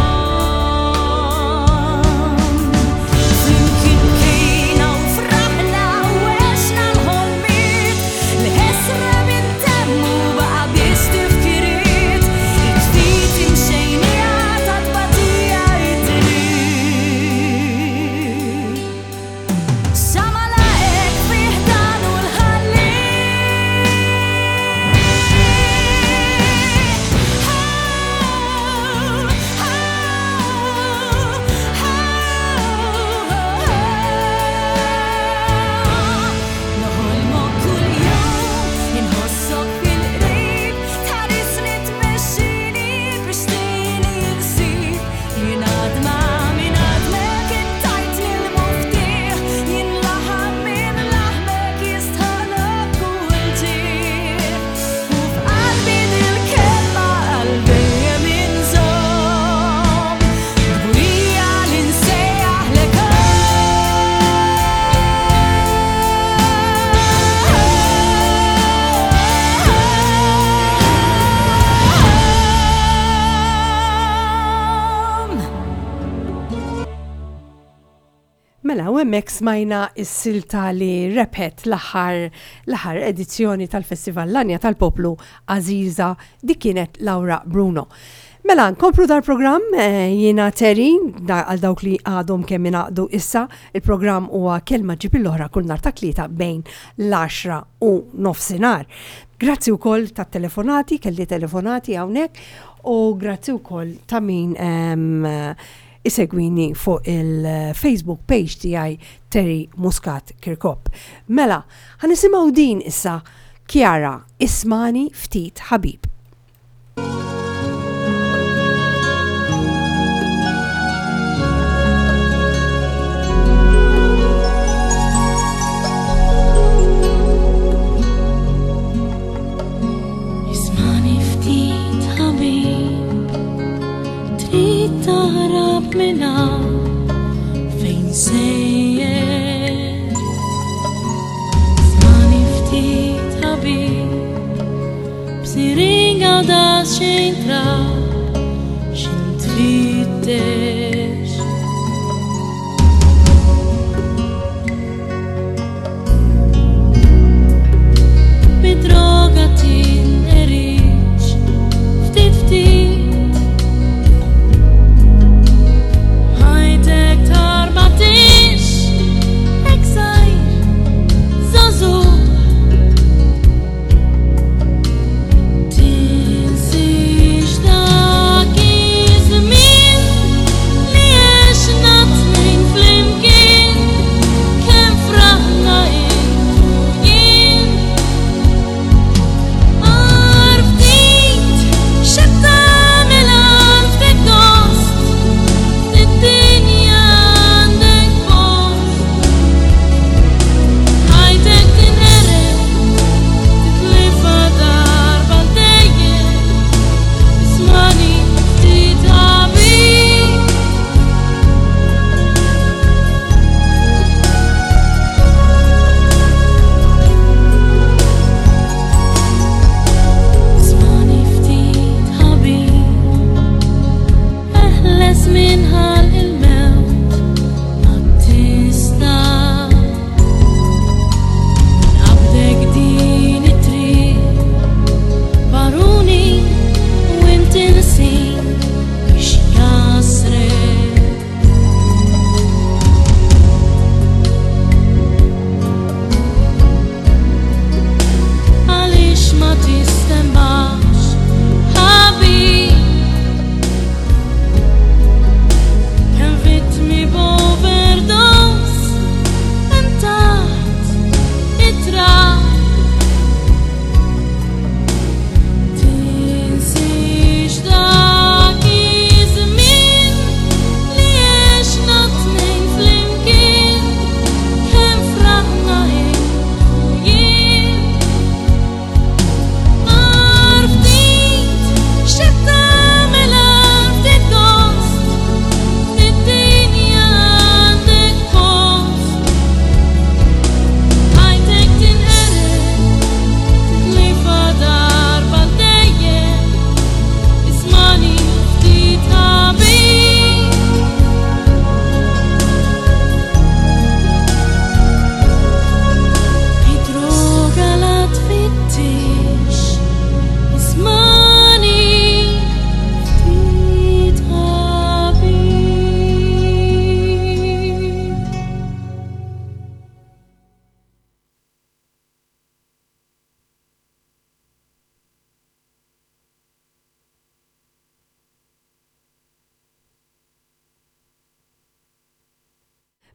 Flimkien bkejna u fraħna u għexna l-ħolmiet li ħesra minn temmu baqa' biss tifkiriet. It-ftit imxejnija ta' tbatija it-triq. Sa ma laqek fih dan u l-ħalliq. Noħolmok kuljum, inħossok fil-qrib, tħarisni tmexxini biex tgħinni insib. Jien għadma minn għadmek intajtni l-muftieħ, jien laħam minn laħmek jistħoqlok kull ġieħ. U f'qalbi dil-kelma għal dejjem inżomm, kburija li nsejjaħlek omm.
Mela, u hemmhekk smajna s-silta li rebħet l-aħħar l-aħħar edizzjoni tal-Festival L-Għanja tal-Poplu Aziza, dik kienet Laura Bruno. Mela, nkomplu dal-programm, eh, jiena Terry, da, għal dawk li għadhom kemm ingħaqdu issa, il-programm huwa Kelma Ġġib l-Oħra kull nhar ta' Tlieta bejn l-għaxra u nofsinhar. Grazzi wkoll ta' telefonati, kelli telefonati hawnhekk, u grazzi wkoll ta' min em, isegwini fuq il-Facebook page tiegħi Terry Muscat Kirkop. Mela, ħa nisimgħu din issa Chiara, Ismagħni Ftit Ħabib.
Ismagħni ftit ħabib, trid taħrab minn hawn fejn sejjer. Ismagħni ftit ħabib, b'siringa u daqsxejn trab, x'int tfittex. Bid-droga tinqeridx, ftit ftit. Ħajtek tarbatix, hekk żgħir, żagħżugħ. Tinsiex dak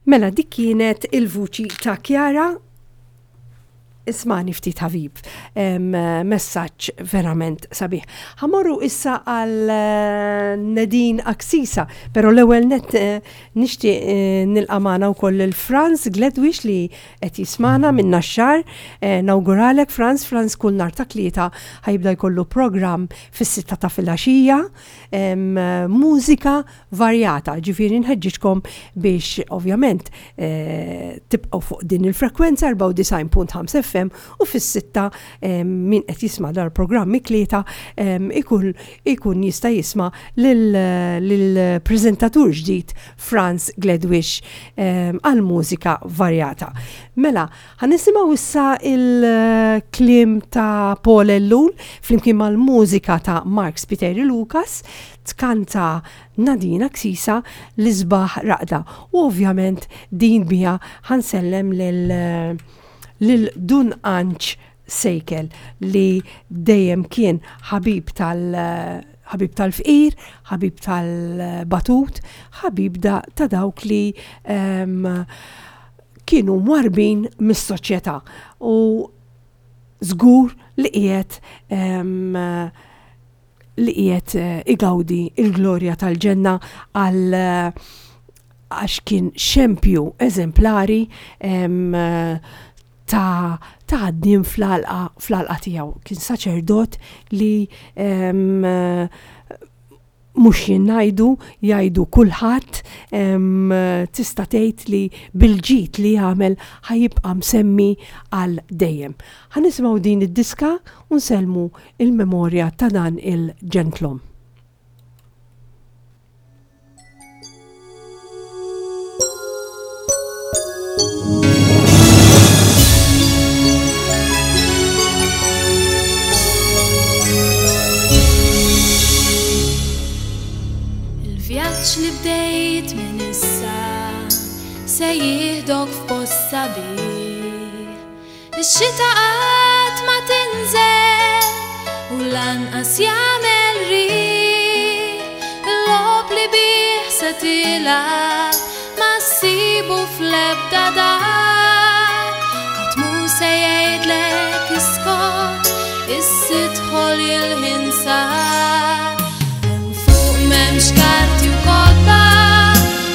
Mela dik kienet il-vuċi ta' Chiara. Ismani ftit ħabib, messaġġ verament sabiħ. Ħa mmorru issa għal eh, Nadine Axisa, pero l-ewwel net eh, nixtieq eh, nilqa' magħna wkoll il-Franz Gledwish li qed jismana minn Naxxar. Nawguralek Franz, Franz kull nhar ta' tlieta ħa jibda jkollu programm fis-sitta ta' filgħaxija, mużika varjata, ġifieri nħeġġiġkom biex ovvjament tibqgħu fuq din il-frekwenza erbgħa u disgħin punt ħamsa F M u fis-sitta min qed jisma' dal-programm it-Tlieta ikun ikun jista' jisma' lill-preżentatur ġdid Franz Gledwish għal mużika varjata. Mela, ħa nisimgħu issa il-kliem ta' Paul Ellul flimkien mal-mużika ta' Mark Spiteri Lucas, tkanta Nadine Axisa, L-Isbaħ Raqda. U ovvjament din bija ħa nsellem lil lil Dun Anġ Sejkel li dejjem kien ħabib tal ħabib tal-fqir, ħabib tal-batut, ħabib da, ta' dawk li um, kienu mwarbin mis-soċjetà u żgur li qiegħed um, li qiegħed eh, igawdi il-glorja tal-ġenna għal għax kien xempju eżemplari um, ta' ta' ħaddiem fl-għalqa fl-għalqa tiegħu. Kien saċerdot li um, mhux jien ngħidu, jgħidu kulħadd, um, tista' tgħid li bil-ġid li jagħmel ħa jibqa' msemmi għal dejjem. Ħa nisimgħu din id-diska u nsellmu il-memorja ta' dan il-ġentlom.
Il-vjaġġ li bdejt minn issa se jieħdok f'post sabiħ. Ix-xita qatt ma tinżel u lanqas jagħmel riħ. Il-logħob li bih se tilgħab ma ssibu fl-ebda dar. Ħadd mhu se jgħidlek iskot, issa idħol il-ħin sar. Hemm fuq m'hemmx karti u kotba,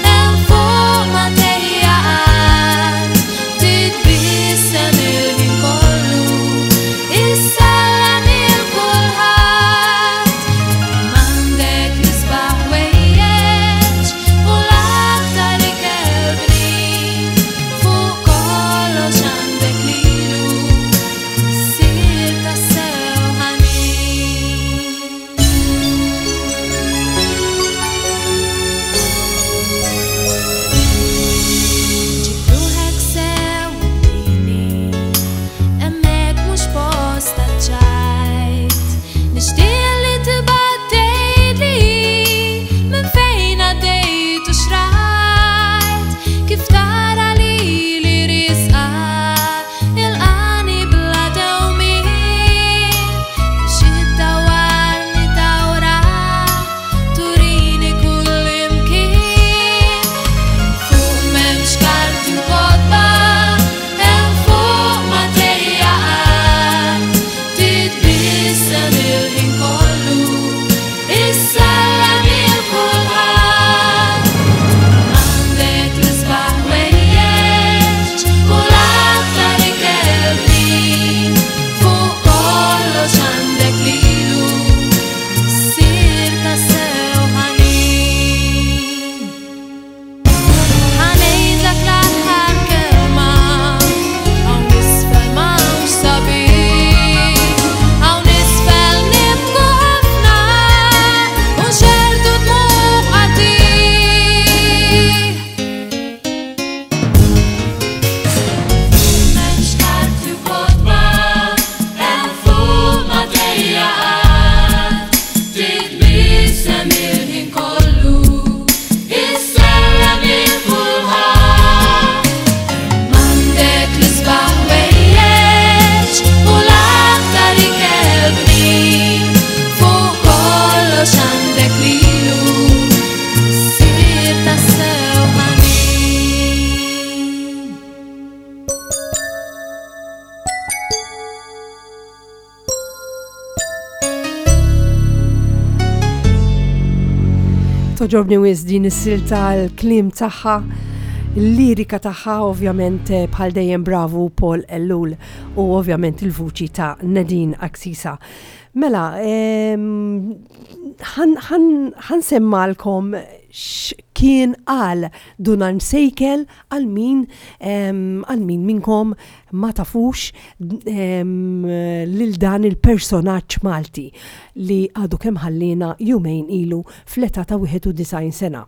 hemm fuq ma tgħejja qatt. Titbissem il-ħin kollu, issellem lil kulħadd. M'għandek l-isbaħ ħwejjeġ u l-aktar ikel bnin. Fuq kollox għandek lilu, ssir tassew ħanin.
Togħġobni wisq din is-silta, l-kliem tagħha, il-lirika tagħha, ovvjament eh, bħal dejjem bravu Paul Ellul u ovvjament il-vuċi ta' Nadine Axisa. Mela, ħa nsemmalkom x'kien qal Dun Anġ Sejkel għal min għal min minnkom ma tafux lil dan il-personaġġ Malti li għadu kemm ħallina jumejn ilu fl-età ta' wieħed u disgħin sena.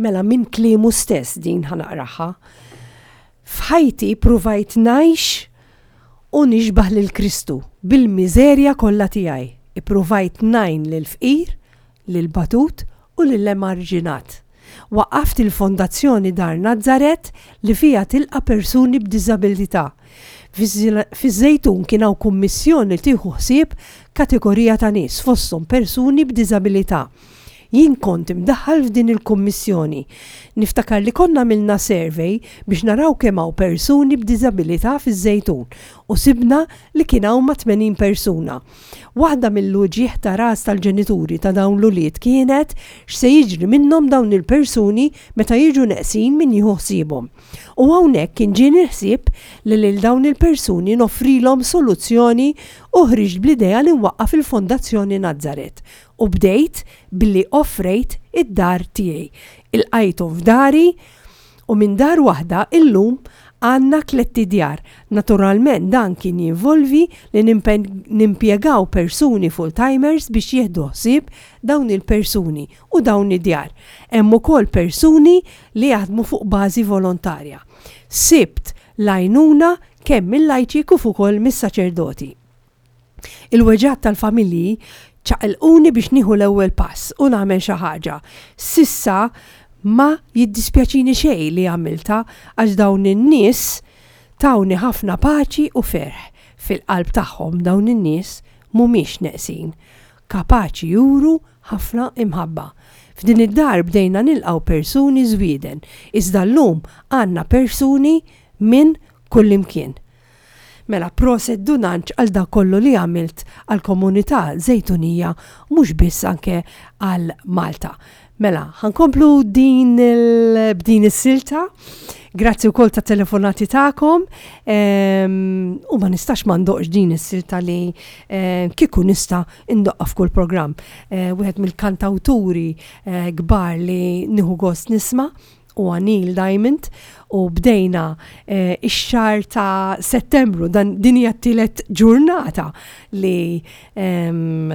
Mela, minn kliemu stess din ħa naqraha. "F'ħajti pruvajt ngħix u nixbaħ lil Kristu bil-miżerja kollha tiegħi. Ippruvajt ngħin lil fqir, lil batut u lil emarġinat. Waqqaft il-Fondazzjoni Dar Nazzaret li fija tilqa persuni b'diżabilità. Fiż-Żejtun kien hawn kummissjoni tieħu ħsieb kategorija ta' nies, fosthom persuni b'diżabilità. Jien kont imdaħħal f'din il-kummissjoni. Niftakar li konna għamilna survey biex naraw kemm hawn persuni b'diżabilità fiż-Żejtun u sibna li kien hawn ma' tmenin persuna. Waħda mill-uġigħ ta' ras tal-ġenituri ta' dawn l-ulied kienet x'se jiġri minnhom dawn il-persuni meta jiġu neqsin min jieħu ħsiebhom. U hawnhekk kien ġieni ħsieb li lil dawn il-persuni noffrilhom soluzzjoni u ħriġt bl-idea li nwaqqaf il-Fondazzjoni Nazzaret u bdejt billi offrejt id-dar tiegħi. Ilqajthom f'dari u minn dar waħda illum għandna tlett idjar. Naturalment dan kien jinvolvi li nimpjegaw persuni full-timers biex jieħdu ħsieb dawn il-persuni u dawn id-djar. Hemm ukoll persuni li jaħdmu fuq bażi volontarja. Sibt l-għajnuna kemm mill-lajċi kif ukoll mis-saċerdoti. Il-weġgħat tal-familji ċaqilquni biex nieħu l-ewwel pass u nagħmel xi ħaġa. S'issa ma jiddispjaċini xejn li għamilta għax dawn in-nies tawni ħafna paċi u ferħ. Fil-qalb tagħhom dawn in-nies mhumiex neqsin, kapaċi juru ħafna imħabba. F'din id-dar bdejna nilqgħu persuni Żwieden, iżda llum għandna persuni minn kullimkien." Mela, proset Dun Anġ għal dak kollu li għamilt għal komunità Żejtunija, mhux biss, anke għal Malta. Mela, ħa nkomplu din il- b'din is-silta. Grazzi wkoll ta' telefonati tagħkom. Ehm, u ma nistax ma ndoqqx din is-silta li eh, kieku nista' indoqqa f'kull programm. Eh, Wieħed mill-kantawturi eh, kbar li nieħu gost nisma' u Neil Diamond u bdejna eh, ix-xahar ta' Settembru, dan din hija t-tielet ġurnata li em,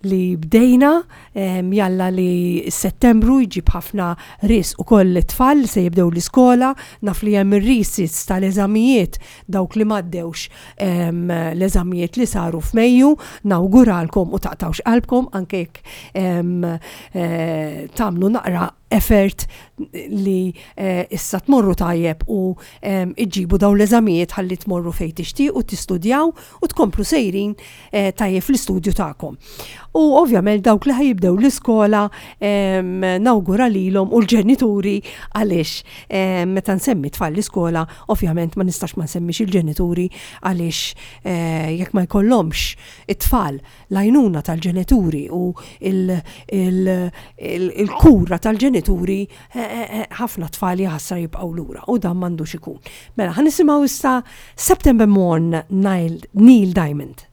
li bdejna, em, jalla li Settembru jġib ħafna ris u koll it-tfal li se jibdew l-iskola, naf li hemm ir-resits tal-eżamijiet, dawk li m'għaddewx em, l-eżamijiet li saru f'Mejju, nawguralkom u taqtawx qalbkom anke jekk em, eh, tagħmlu naqra effort li eh, issa tmorru tajjeb u em, iġibu dawn l-eżamijiet ħalli tmorru fejn tixtiequ tistudjaw u tkomplu sejrin eh, tajjeb fl-istudju tagħkom. U ovvjament dawk li ħa jibdew l-iskola em, nawgura lilhom u l-ġenituri għaliex em, meta nsemmi tfal l-iskola ovvjament ma nistax ma nsemmix il-ġenituri għaliex eh, jekk ma jkollhomx it-tfal l-għajnuna tal-ġenituri u il- il- il- il-kura tal-ġenituri, eh, eh, eh, ħafna tfal jaħasra jibqgħu lura u dan m'għandux ikun. Mela, ħa nisimgħu issa September Morn, Neil, Neil Diamond.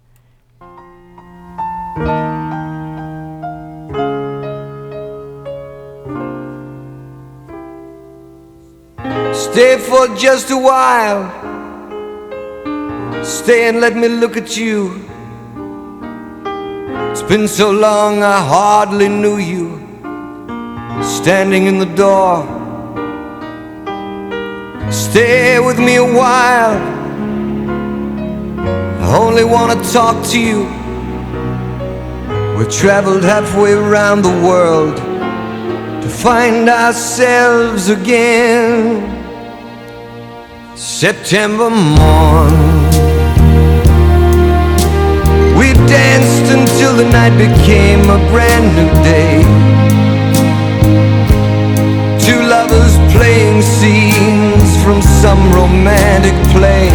Stay for just a while. Stay and let me look at you. It's been so long I hardly knew you. Standing in the door. Stay with me a while. I only want to talk to you. We've traveled halfway around the world to find ourselves again. September morn. We danced until the night became a brand new day. Two lovers playing scenes from some romantic play.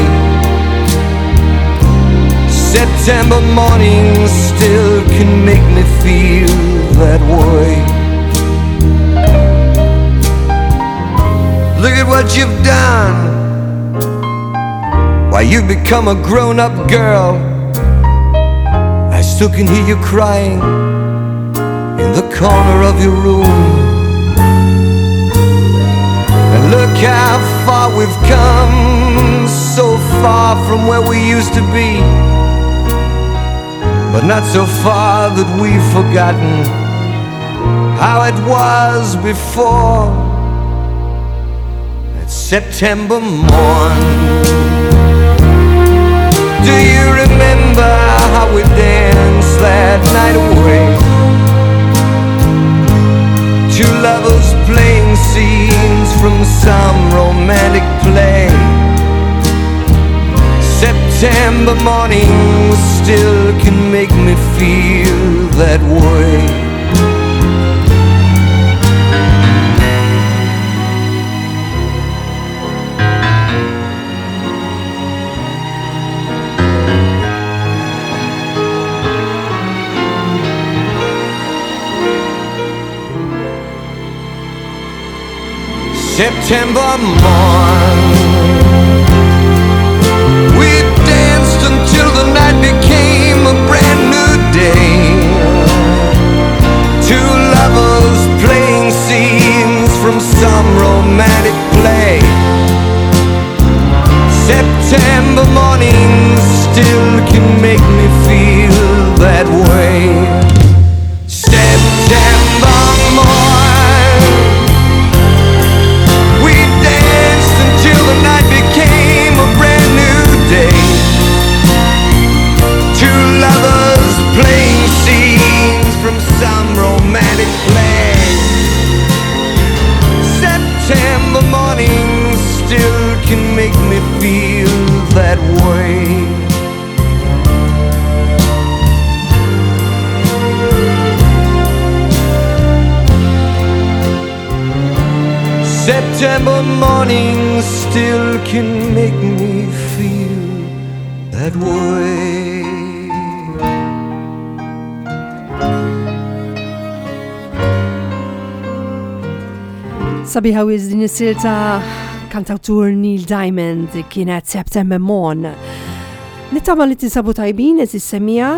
September mornings still can make me feel that way. Look at what you've done. Why, you've become a grown up girl. I still can hear you crying in the corner of your room. And look how far we've come, so far from where we used to be. But not so far that we've forgotten how it was before. That September morn. Do you remember how we danced that night away? Two lovers playing scenes from some romantic play. September mornings still can make me feel that way. September morn. We danced until the night became a brand new day. Two lovers playing scenes from some romantic play. September mornings still can make me feel that way. September morn. We danced until the night became a brand new day. Two lovers playing scenes from some romantic play. September mornings still can make me feel that way. September mornings still can make me feel that way.
Sabiħa wiz din is-silta kantawtur Neil Diamond kienet September Morn. Nittama li tinsabu tajbin, eżis semija,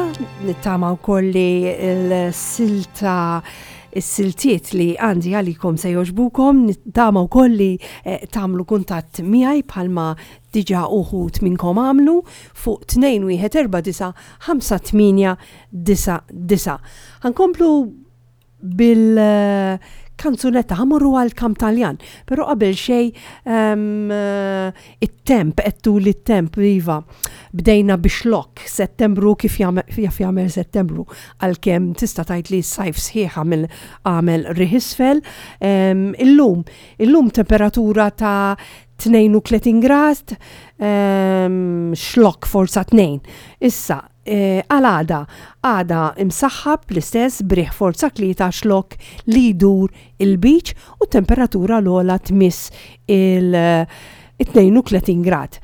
nittama wkoll li l-silta is-siltiet li għandi għalikom se joġbukom, nittama wkoll li eh, tagħmlu kuntatt miegħi bħalma diġà uħud minnkom għamlu fuq tnejn wieħed erba' disa' ħamsa tmienja disa' disa'. Ħankomplu bil kanzunetta, ħamorru għal kam Taljan, pero qabel xej um, it-temp, ettu li t-temp, iva, bdejna bixlok, settembru kif jaf jagħmel settembru, għalkemm tista' tgħid li s-sajf sħiħ għamel għamel riħisfel. Um, illum, illum temperatura ta' tnejn u tletin grad, um, xlok forza tnejn. Issa, għal-għada, għada imsaħħab l-istess briħ forza tlieta xlok li jdur il-beach u temperatura l-ogħla tmiss il-tnejn u tletin grad.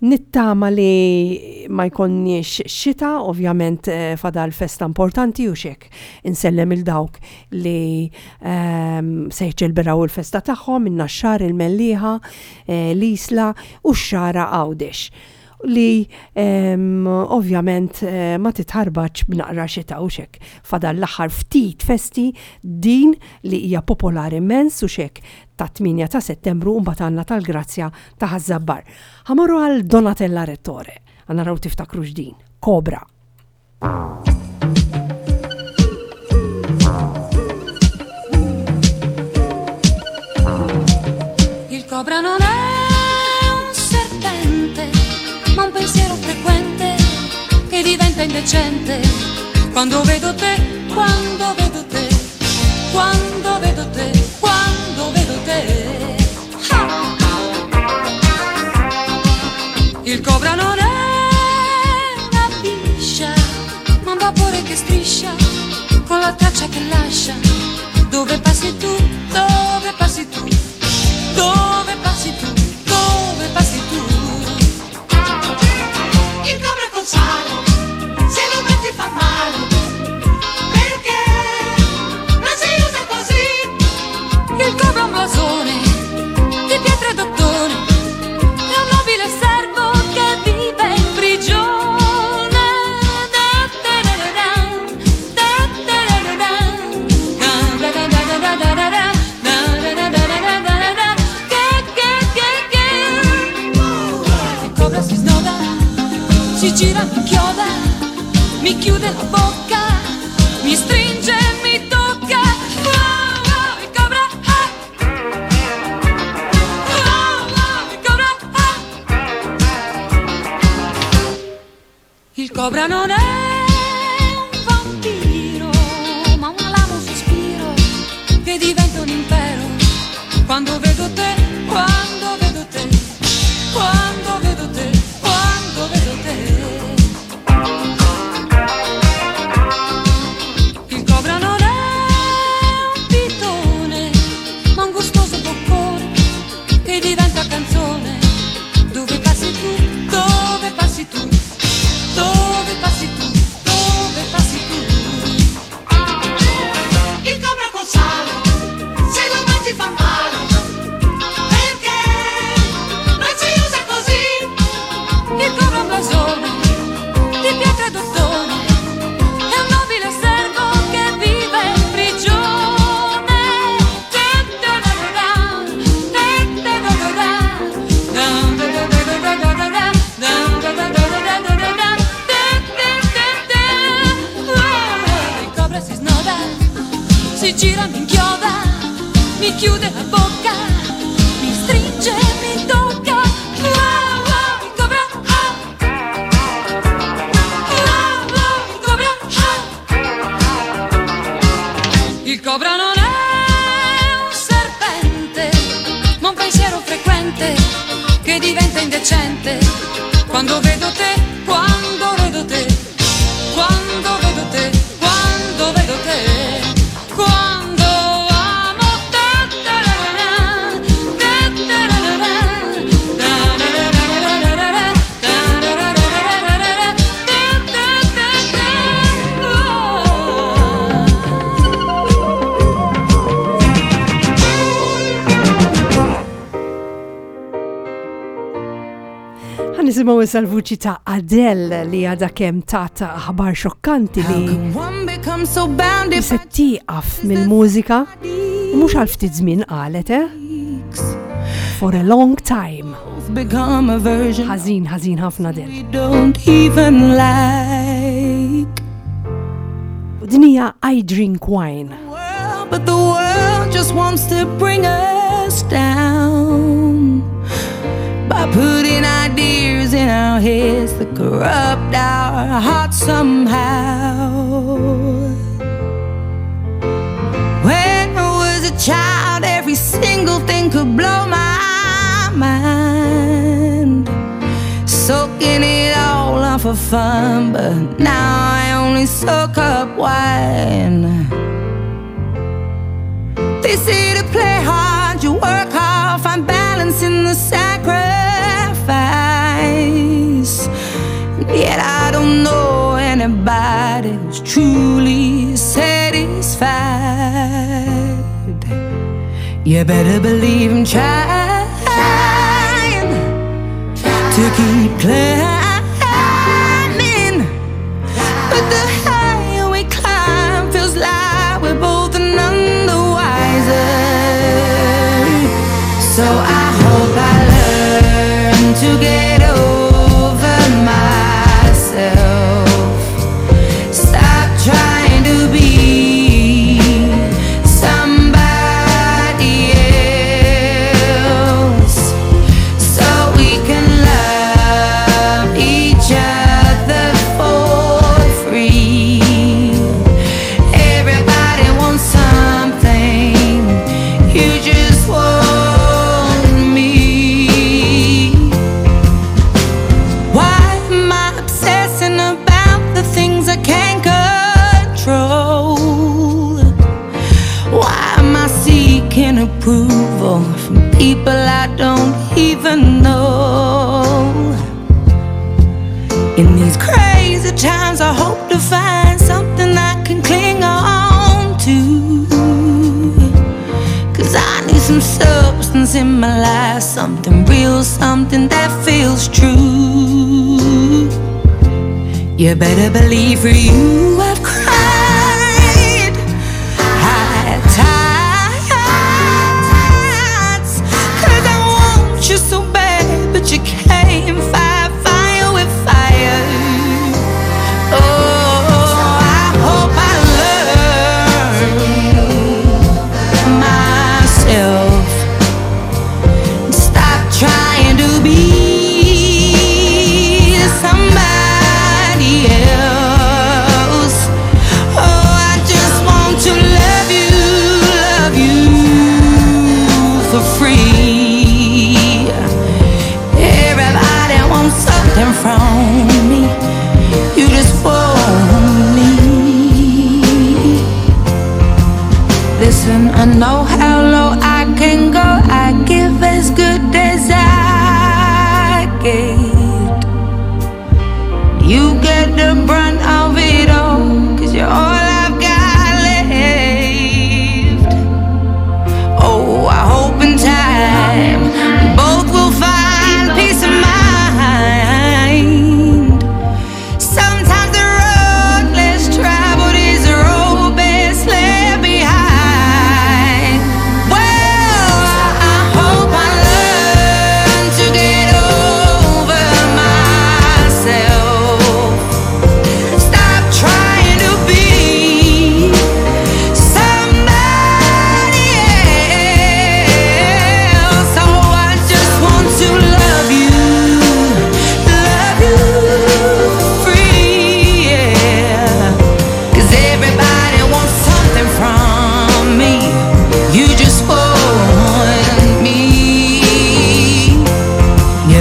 Nittama li ma jkonniex xita, ovvjament fadal festa importanti u xek. Insellem il-dawk li um, se jċelberaw il-festa tagħhom, in-Naxxar, il-Mellieħa, l-Isla u x-Xagħra Għawdex. Li um, ovvjament uh, ma titħarbaċ b'naqra xita u xek. Fadal l-aħħar ftit festi din li hija popolari immens u xek ta' tmienja ta' settembru u mbagħad għandna tal-Grazzja ta' Ħaż-Żabbar. Ħamorru għal Donatella Rettore. Għanaraw tiftakru x'din. Cobra.
Il cobra non è un serpente, ma un pensiero frequente che diventa indecente quando vedo te, quando vedo te, quando vedo te, quando vedo te. Ah! Il cobra non è una biscia, ma un vapore che striscia con la traccia che lascia. Dove passi tu, dove passi tu, dove passi tu, dove passi tu. Il cobra col sale, se lo metti fa male, perché non si usa così. Il cobra è un blasone di pietra Si gira, mi chioda, mi chiude la bocca, mi stringe e mi tocca. Oh, oh, il cobra, ah. Oh, oh, il cobra, ah. Il cobra non è un vampiro, ma un alamo sospiro che diventa un impero. Quando vedo te, quando vedo te, quando vedo te, quando vedo te. Il cobra non è un pitone, ma un gustoso boccone che diventa canzone. Dove passi tu, dove passi tu, dove passi tu, dove passi tu.
Il cobra col sale, se lo mangi fa male, perché non si usa così.
Il cobra è un blasone di pietra e d'ottone, è un nobile servo che vive in prigione. Il cobra si snoda, si gira, mi inchioda, mi chiude la bocca, mi stringe e mi tocca. Wow, wow, il cobra, ah. Wow, wow, il cobra, ah. Il cobra non è un serpente, ma un pensiero frequente che diventa indecente. Quando vedo te, quando vedo te, quando vedo te, quando vedo te, quando amo te, ta ra ra ra, te ta ra ra ra, ta ra ra ra ra ra ra, ta ra ra ra ra ra ra, te te te te, oh.
Ħa nisimgħu issa l-vuċi ta' Adele li għadha kemm tata aħbar xokkanti li
One becomes so bound
li se tieqaf mill-mużika u mhux għal ftit żmien qalet, eh? For a long time.
become a version
Ħażin, ħażin ħafna Adele.
we don't even like.
U din hija I Drink Wine.
World, but the world just wants to bring us down by putting ideas in our heads that corrupt our hearts somehow. When I was a child, every single thing could blow my mind. Soaking it all up for fun, but now I only soak up wine. They say to play hard, you work hard, find balance in the sacrifice. Yet I don't know anybody who's truly satisfied. You better believe I'm trying to keep climbing. But the higher we climb, feels like we're both none the wiser. So I hope I learn to get over myself. Stop trying to be somebody else, so we can love each other for free. Everybody wants something, you just want me. Why am I obsessing about the things I can't control? Why am I seeking approval from people I don't even know? In these crazy times, I hope to find something I can cling on to. Cause I need some substance in my life, something real, something that feels true. You better believe for you I've cried high tides. Cause I want you so bad, but you can't fight fire with fire.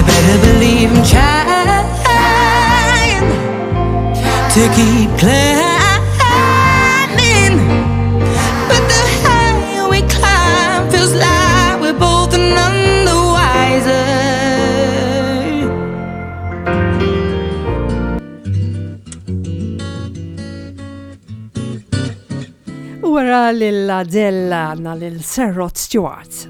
You better believe I'm trying to keep climbing. But the higher we climb, feels like we're both none the wiser.
U wara lil Adele għandna lil Sir Rod Stewart.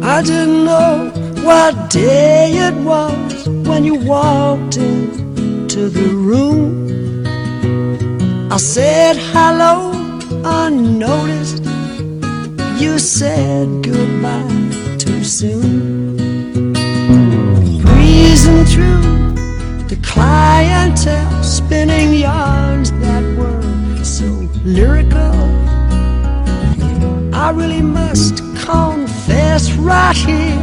I didn't know what day it was when you walked into the room. I said hello unnoticed. You said goodbye too soon. Breezing through the clientele, spinning yarns that were so lyrical. I really must confess right here,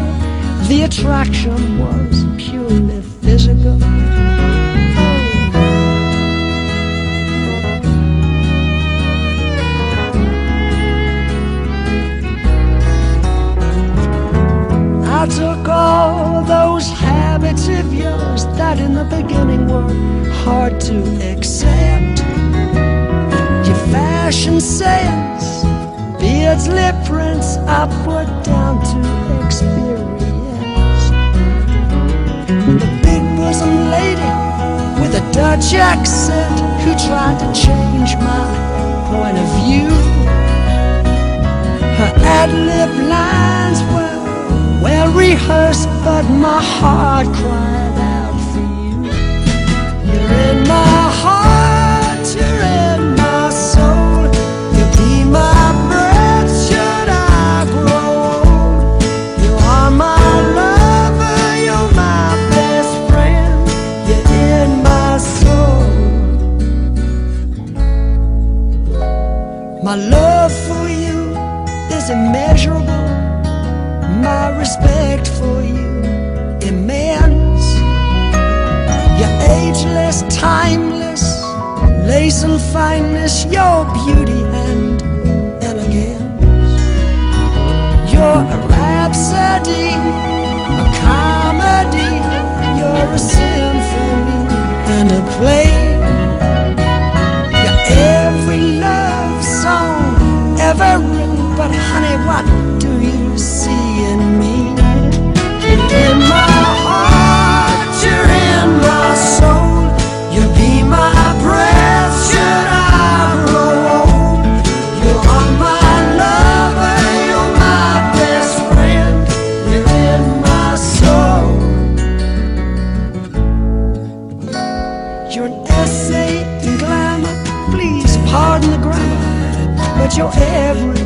the attraction was purely physical. I took all those habits of yours that in the beginning were hard to accept. Your fashion sense, beards, lip prints, I put down to experience. The big bosom lady with a Dutch accent who tried to change my point of view. Her ad-lib lines were well rehearsed, but my heart cried out for you. You're in my heart, you're in my soul. You'll be my breath should I grow old. You are my lover, you're my best friend. You're in my soul. My love for you is immeasurable. My respect for you immense. You're ageless, timeless, lace and fineness, your beauty and elegance. You're a rhapsody, a comedy, you're a symphony and a play. You're every love song ever written, but honey, what do you see in me? In my heart, you're in my soul. You'll be my breath should I grow old. You are my lover, you're my best friend. You're in my soul. You're an essay in glamour. Please pardon the grammar, but you're every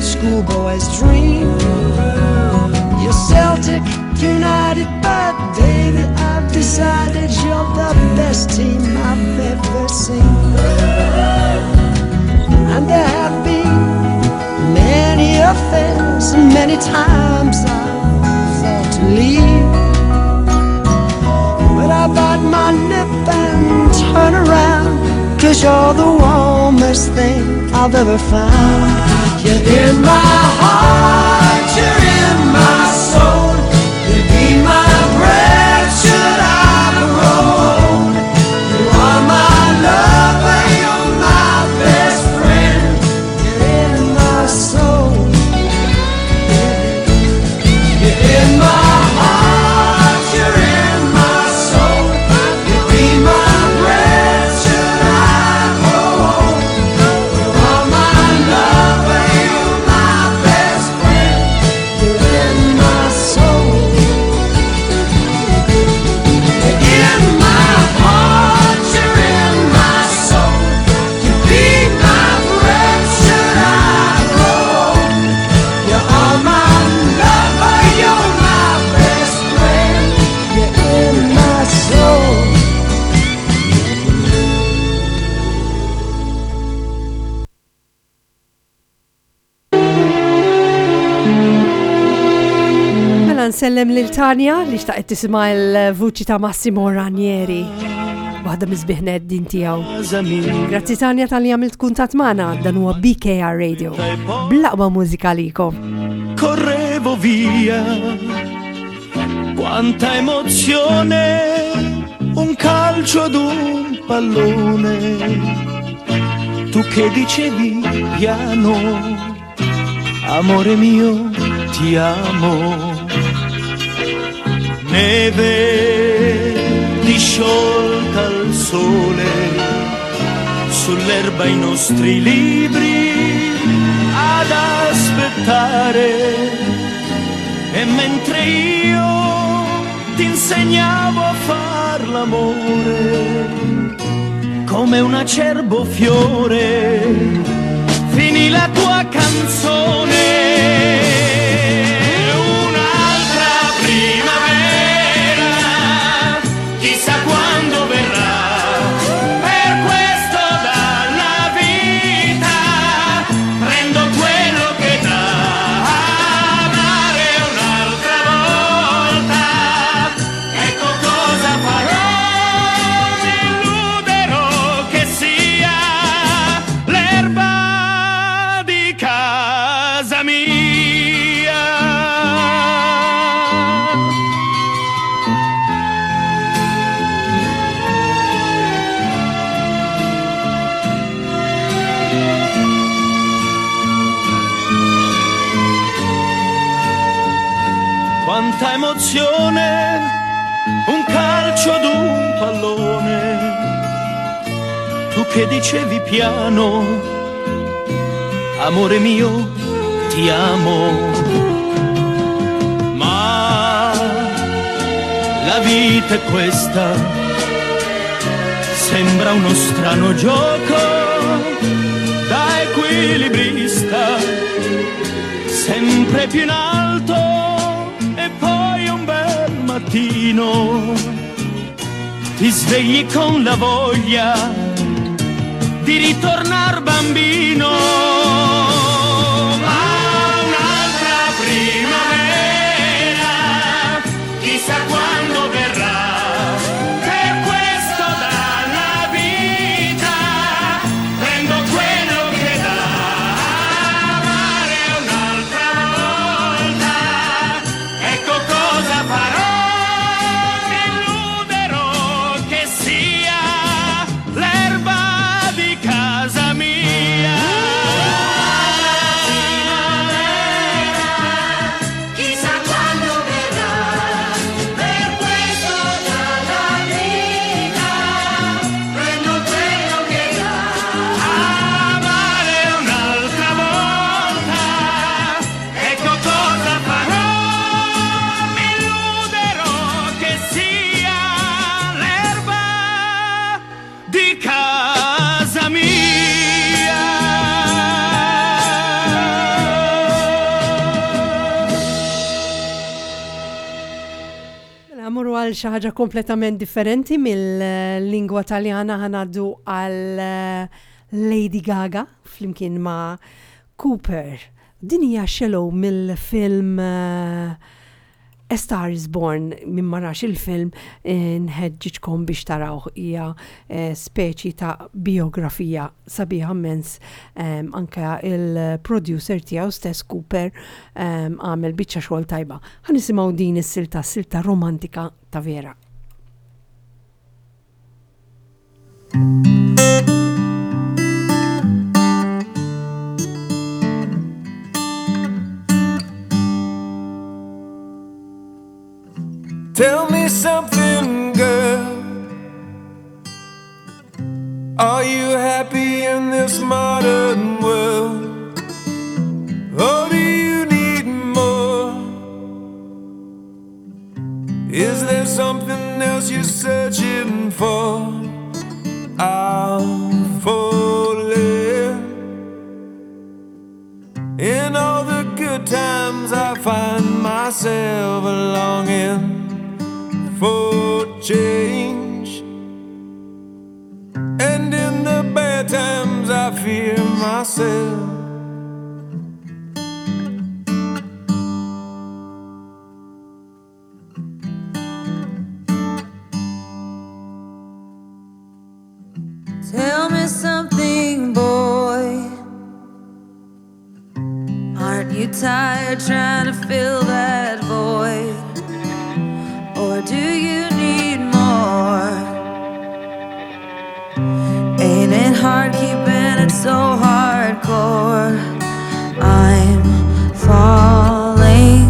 schoolboy's dream. You're Celtic United, but baby, I've decided you're the best team I've ever seen. And there have been many affairs, and many times I've thought to leave. But I bite my lip and turn around, 'cause you're the warmest thing I've ever found. You're in my heart, you're in my soul. You'll be my breath should I grow old. You are my lover, you're my best friend. You're in my soul. You're in my heart, you're in my soul. You'll be my breath should I grow old. You are my lover, you're my best friend. You're in my soul. You're in my heart, you're in my soul. You'll be my breath should I grow old. You are my lover, you're my best friend. You're in my soul.
Mela nsellem lil Tanja li xtaqet tisma' l-vuċi ta' Massimo Ranieri. Waħda mill-isbaħ din tiegħu. Grazzi Tanja talli għamilt kuntatt magħna, dan huwa B K R Radio. Bl-aqwa mużika likom.
Correvo via. Quanta emozione, un calcio ad un pallone. Tu che dicevi piano, amore mio, ti amo. Neve disciolta al sole, sull'erba i nostri libri ad aspettare. E mentre io ti insegnavo a far l'amore, come un acerbo fiore, finì la tua canzone. Un'altra primavera, chissà quando verrà, per questo dalla vita prendo quello che dà. Amare un'altra volta, ecco cosa farò, mi illuderò che sia l'erba di casa mia. Quanta emozione, un calcio ad un pallone. Tu che dicevi piano, amore mio, ti amo. Ma la vita è questa, sembra uno strano gioco da equilibrista, sempre più in alto. E poi un bel mattino ti svegli con la voglia di ritornar bambino. Ma un'altra primavera, chissà quando verrà, per questo dalla vita prendo quello che dà. Amare un'altra volta, ecco cosa farò, mi illuderò che sia l'erba di casa mia.
Chissà quando verrà, per questo dalla vita prendo quello che dà.
Amare un'altra volta, ecco cosa farò, mi illuderò che sia l'erba di casa mia.
Mela, mmorru għal xi ħaġa kompletament differenti mill-lingwa Taljana, ħa ngħaddu għal eh, Lady Gaga flimkien ma' Cooper. Din hija Shallow mill-film eh, A Star is Born. Min ma rax il-film eh, nħeġġiġkom biex tarawh, hija eh, speċi ta' biografija sabiħa immens. um, anke il-producer tiegħu stess Cooper em, għamel biċċa xogħol tajba. Ħa nisimgħu din is-silta, silta romantika ta' vera.
Tell me something, girl. Are you happy in this modern world? Or do you need more? Is there something else you're searching for? I'm falling. In all the good times, I find myself longing for change. And in the bad times, I fear myself.
Tell me something, boy. Aren't you tired trying to fill that void? so hardcore. I'm falling.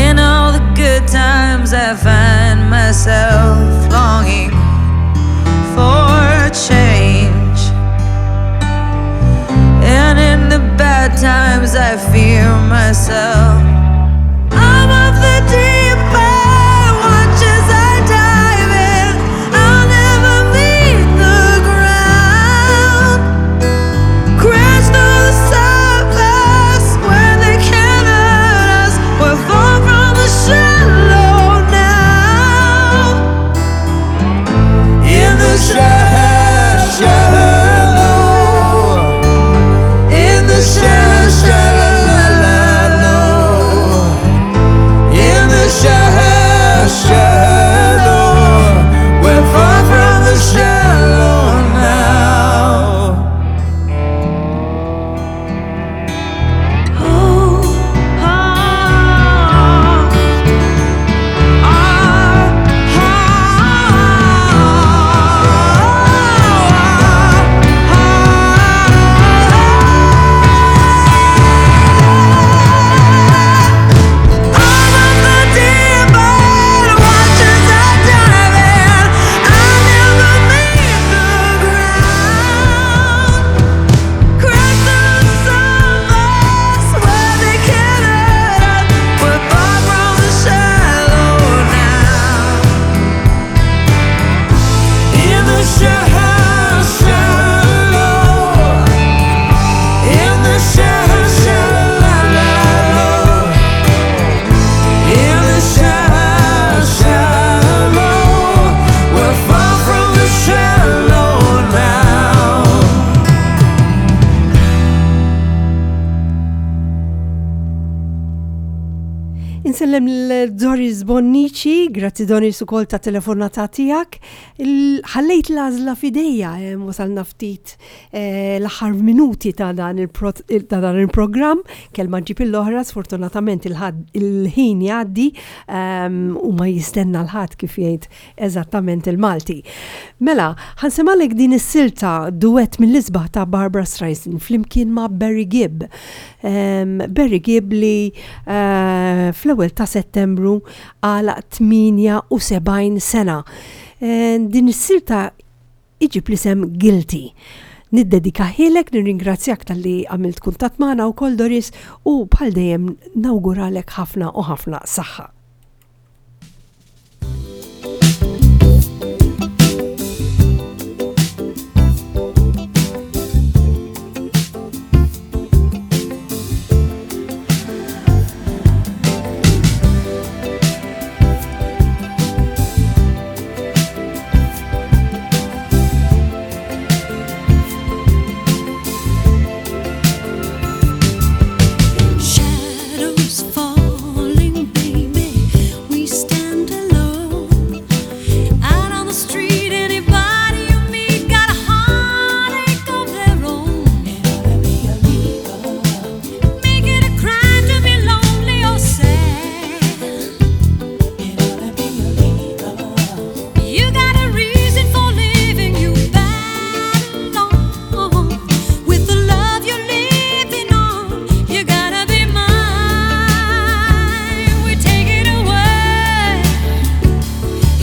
In all the good times, I find myself longing for change. And in the bad times, I fear myself. I'm off the deep end, watch as I dive in. I'll never meet the ground. Crash through the surface where they can't hurt us. We're far from the shallow now.
In the shallow, shallow, in the shallow, shallow, in the shallow, shallow, we're far from the shallow now.
Oh, oh,
In the shallow, shallow, in the shallow, shallow, in the shallow, shallow, we're far from the shallow now.
Insellem l-Doris Bonnici, grazzi Doris ukoll ta' telefonata tiegħek. Il- Ħallejt l-għażla f'idejja, eh, wasalna ftit eh, l-aħħar minuti ta' dan il-pro- ta' dan il-programm, kelma ġib l-oħra, sfortunatament il-ħad- il-ħin jgħaddi ehm, u ma jistenna l-ħadd kif jgħid eżattament il-Malti. Mela, ħa nsemmalek din is-silta duet mill-isbaħ ta' Barbara Streisand flimkien ma' Barry Gibb. Um, Barry Gibb li uh, fl-ewwel ta' Settembru għalaq tmienja u sebgħin sena. Eh, din is-silta iġib l-isem Guilty. Niddedikahielek, nirringrazzjak talli għamilt kuntatt magħna wkoll, Doris, u bħal dejjem nawguralek ħafna u ħafna saħħa.
Shadows falling, baby. We stand alone out on the street. Anybody you meet got a heartache of their own. Make it a crime to be lonely or sad. You got a reason for living. You battle on with the love you're living on. You gotta be mine. We take it away.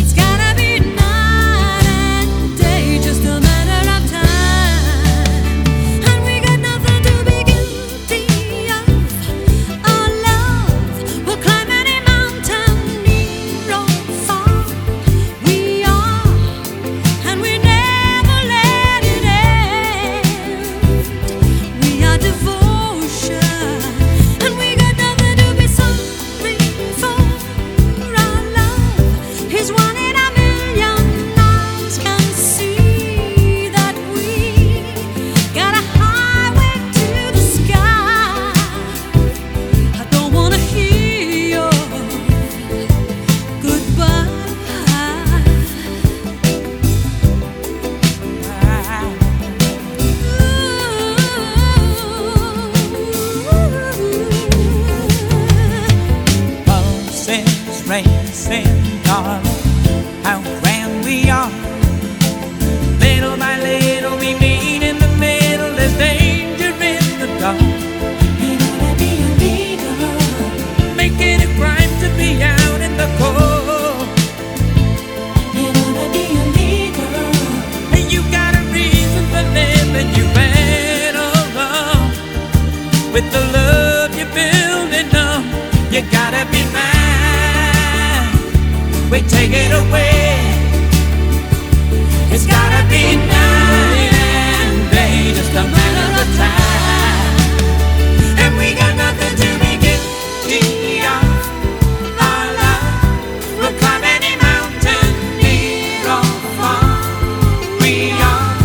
It's gotta be night and day, just a matter of time. And we got nothing to be guilty of. Our love will climb any mountain, near or far. We are, and we never let it end. We are devotion, and we got nothing to be sorry for. Our love is one in a million. Eyes can see that we got a highway to the sky. I don't wanna hear your goodbye.
Pulses racing, darling, how grand we are. Little by little, With the love you're building up, you gotta be mine. We take it away. It's gotta be night and day, just a matter of time. And we got nothing to be guilty of. Our love will climb any mountain, near or far. We are,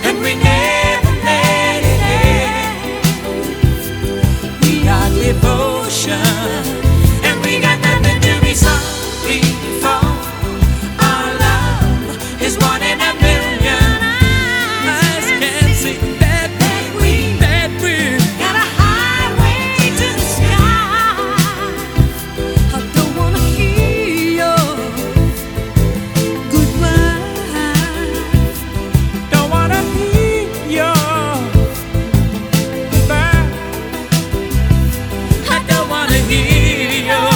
and we never let it end. We are devotion, and we got nothing to be sorry for. Our love is one in a million. Eyes can't see that we, that we
got a highway to the sky. I don't wanna hear your goodbye.
Don't wanna hear your goodbye. I don't wanna hear your.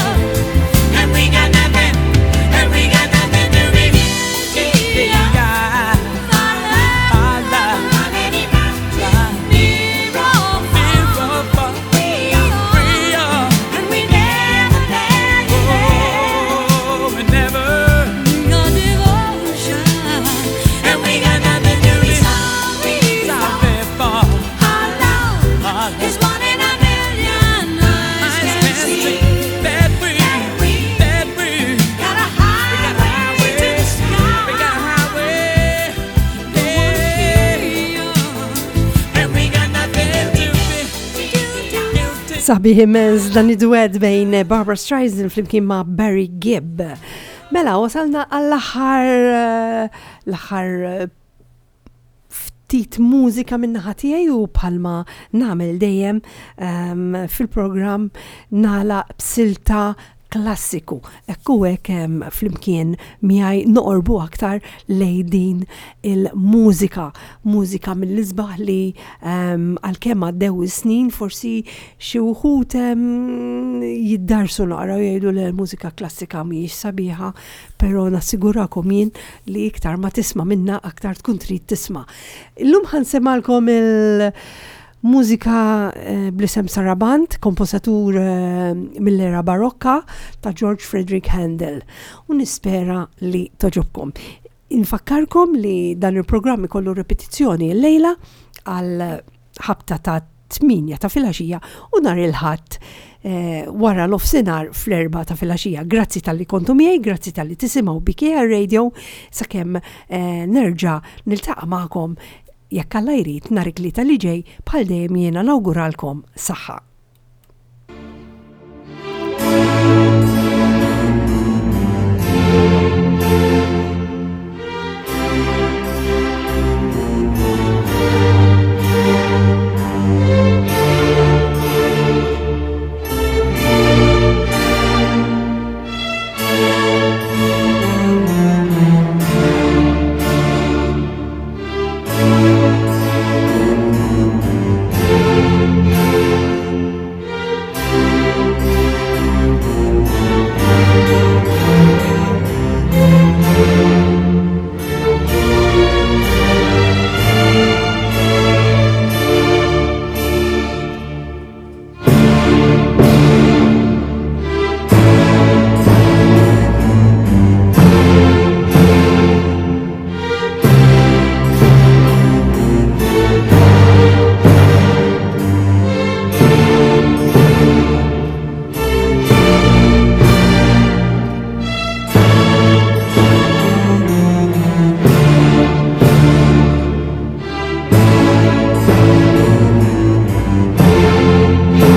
And we got nothing, and we got nothing to be guilty of. Our love,
Near or far, we are, and we never let it end.
Oh, we never.
We are devotion,
And we got nothing to be
sorry
sorry for.
Our love is one in a million. Eyes can see
that we, that we
got a highway to the sky.
We got a highway, yeah. And we got nothing to be guilty.
Sabiħ immens dan id-duet bejn Barbra Streisand flimkien ma' Barry Gibb. Mela, wasalna għall-aħħar l-aħħar eh, ftit mużika min-naħa tiegħi u bħalma nagħmel dejjem um, fil-programm nagħlaq b'silta klassiku. Ekku hekk em, flimkien miegħi noqorbu aktar lej din il-mużika. Mużika mill-isbaħ li um, għalkemm għaddew is-snin forsi xi wħud em, jiddarsu naqra u jgħidu li l-mużika klassika mhijiex sabiħa, però nassigurakom jien li iktar ma tisma' minna aktar tkun trid tisma'. Illum ħa nsemmagħlkom il- Mużika eh, bl-isem Saraband, komposatur eh, mill-era barokka ta' George Frederick Handel. U nispera li togħġobkom. Infakkarkom li dan il-programm ikollu repetizzjoni l-lejla għal ħabta ta' tmienja ta' filgħaxija u nhar il-Ħadd eh, wara nofsinhar fl-erbgħa ta' filgħaxija. Grazzi talli kontu miegħi, grazzi talli tisimgħu B K R Radio sakemm eh, nerġa' niltaqa' magħkom, jekk Alla jrid, nhar it-Tlieta li ġej. Bħal dejjem jiena nawguralkom saħħa.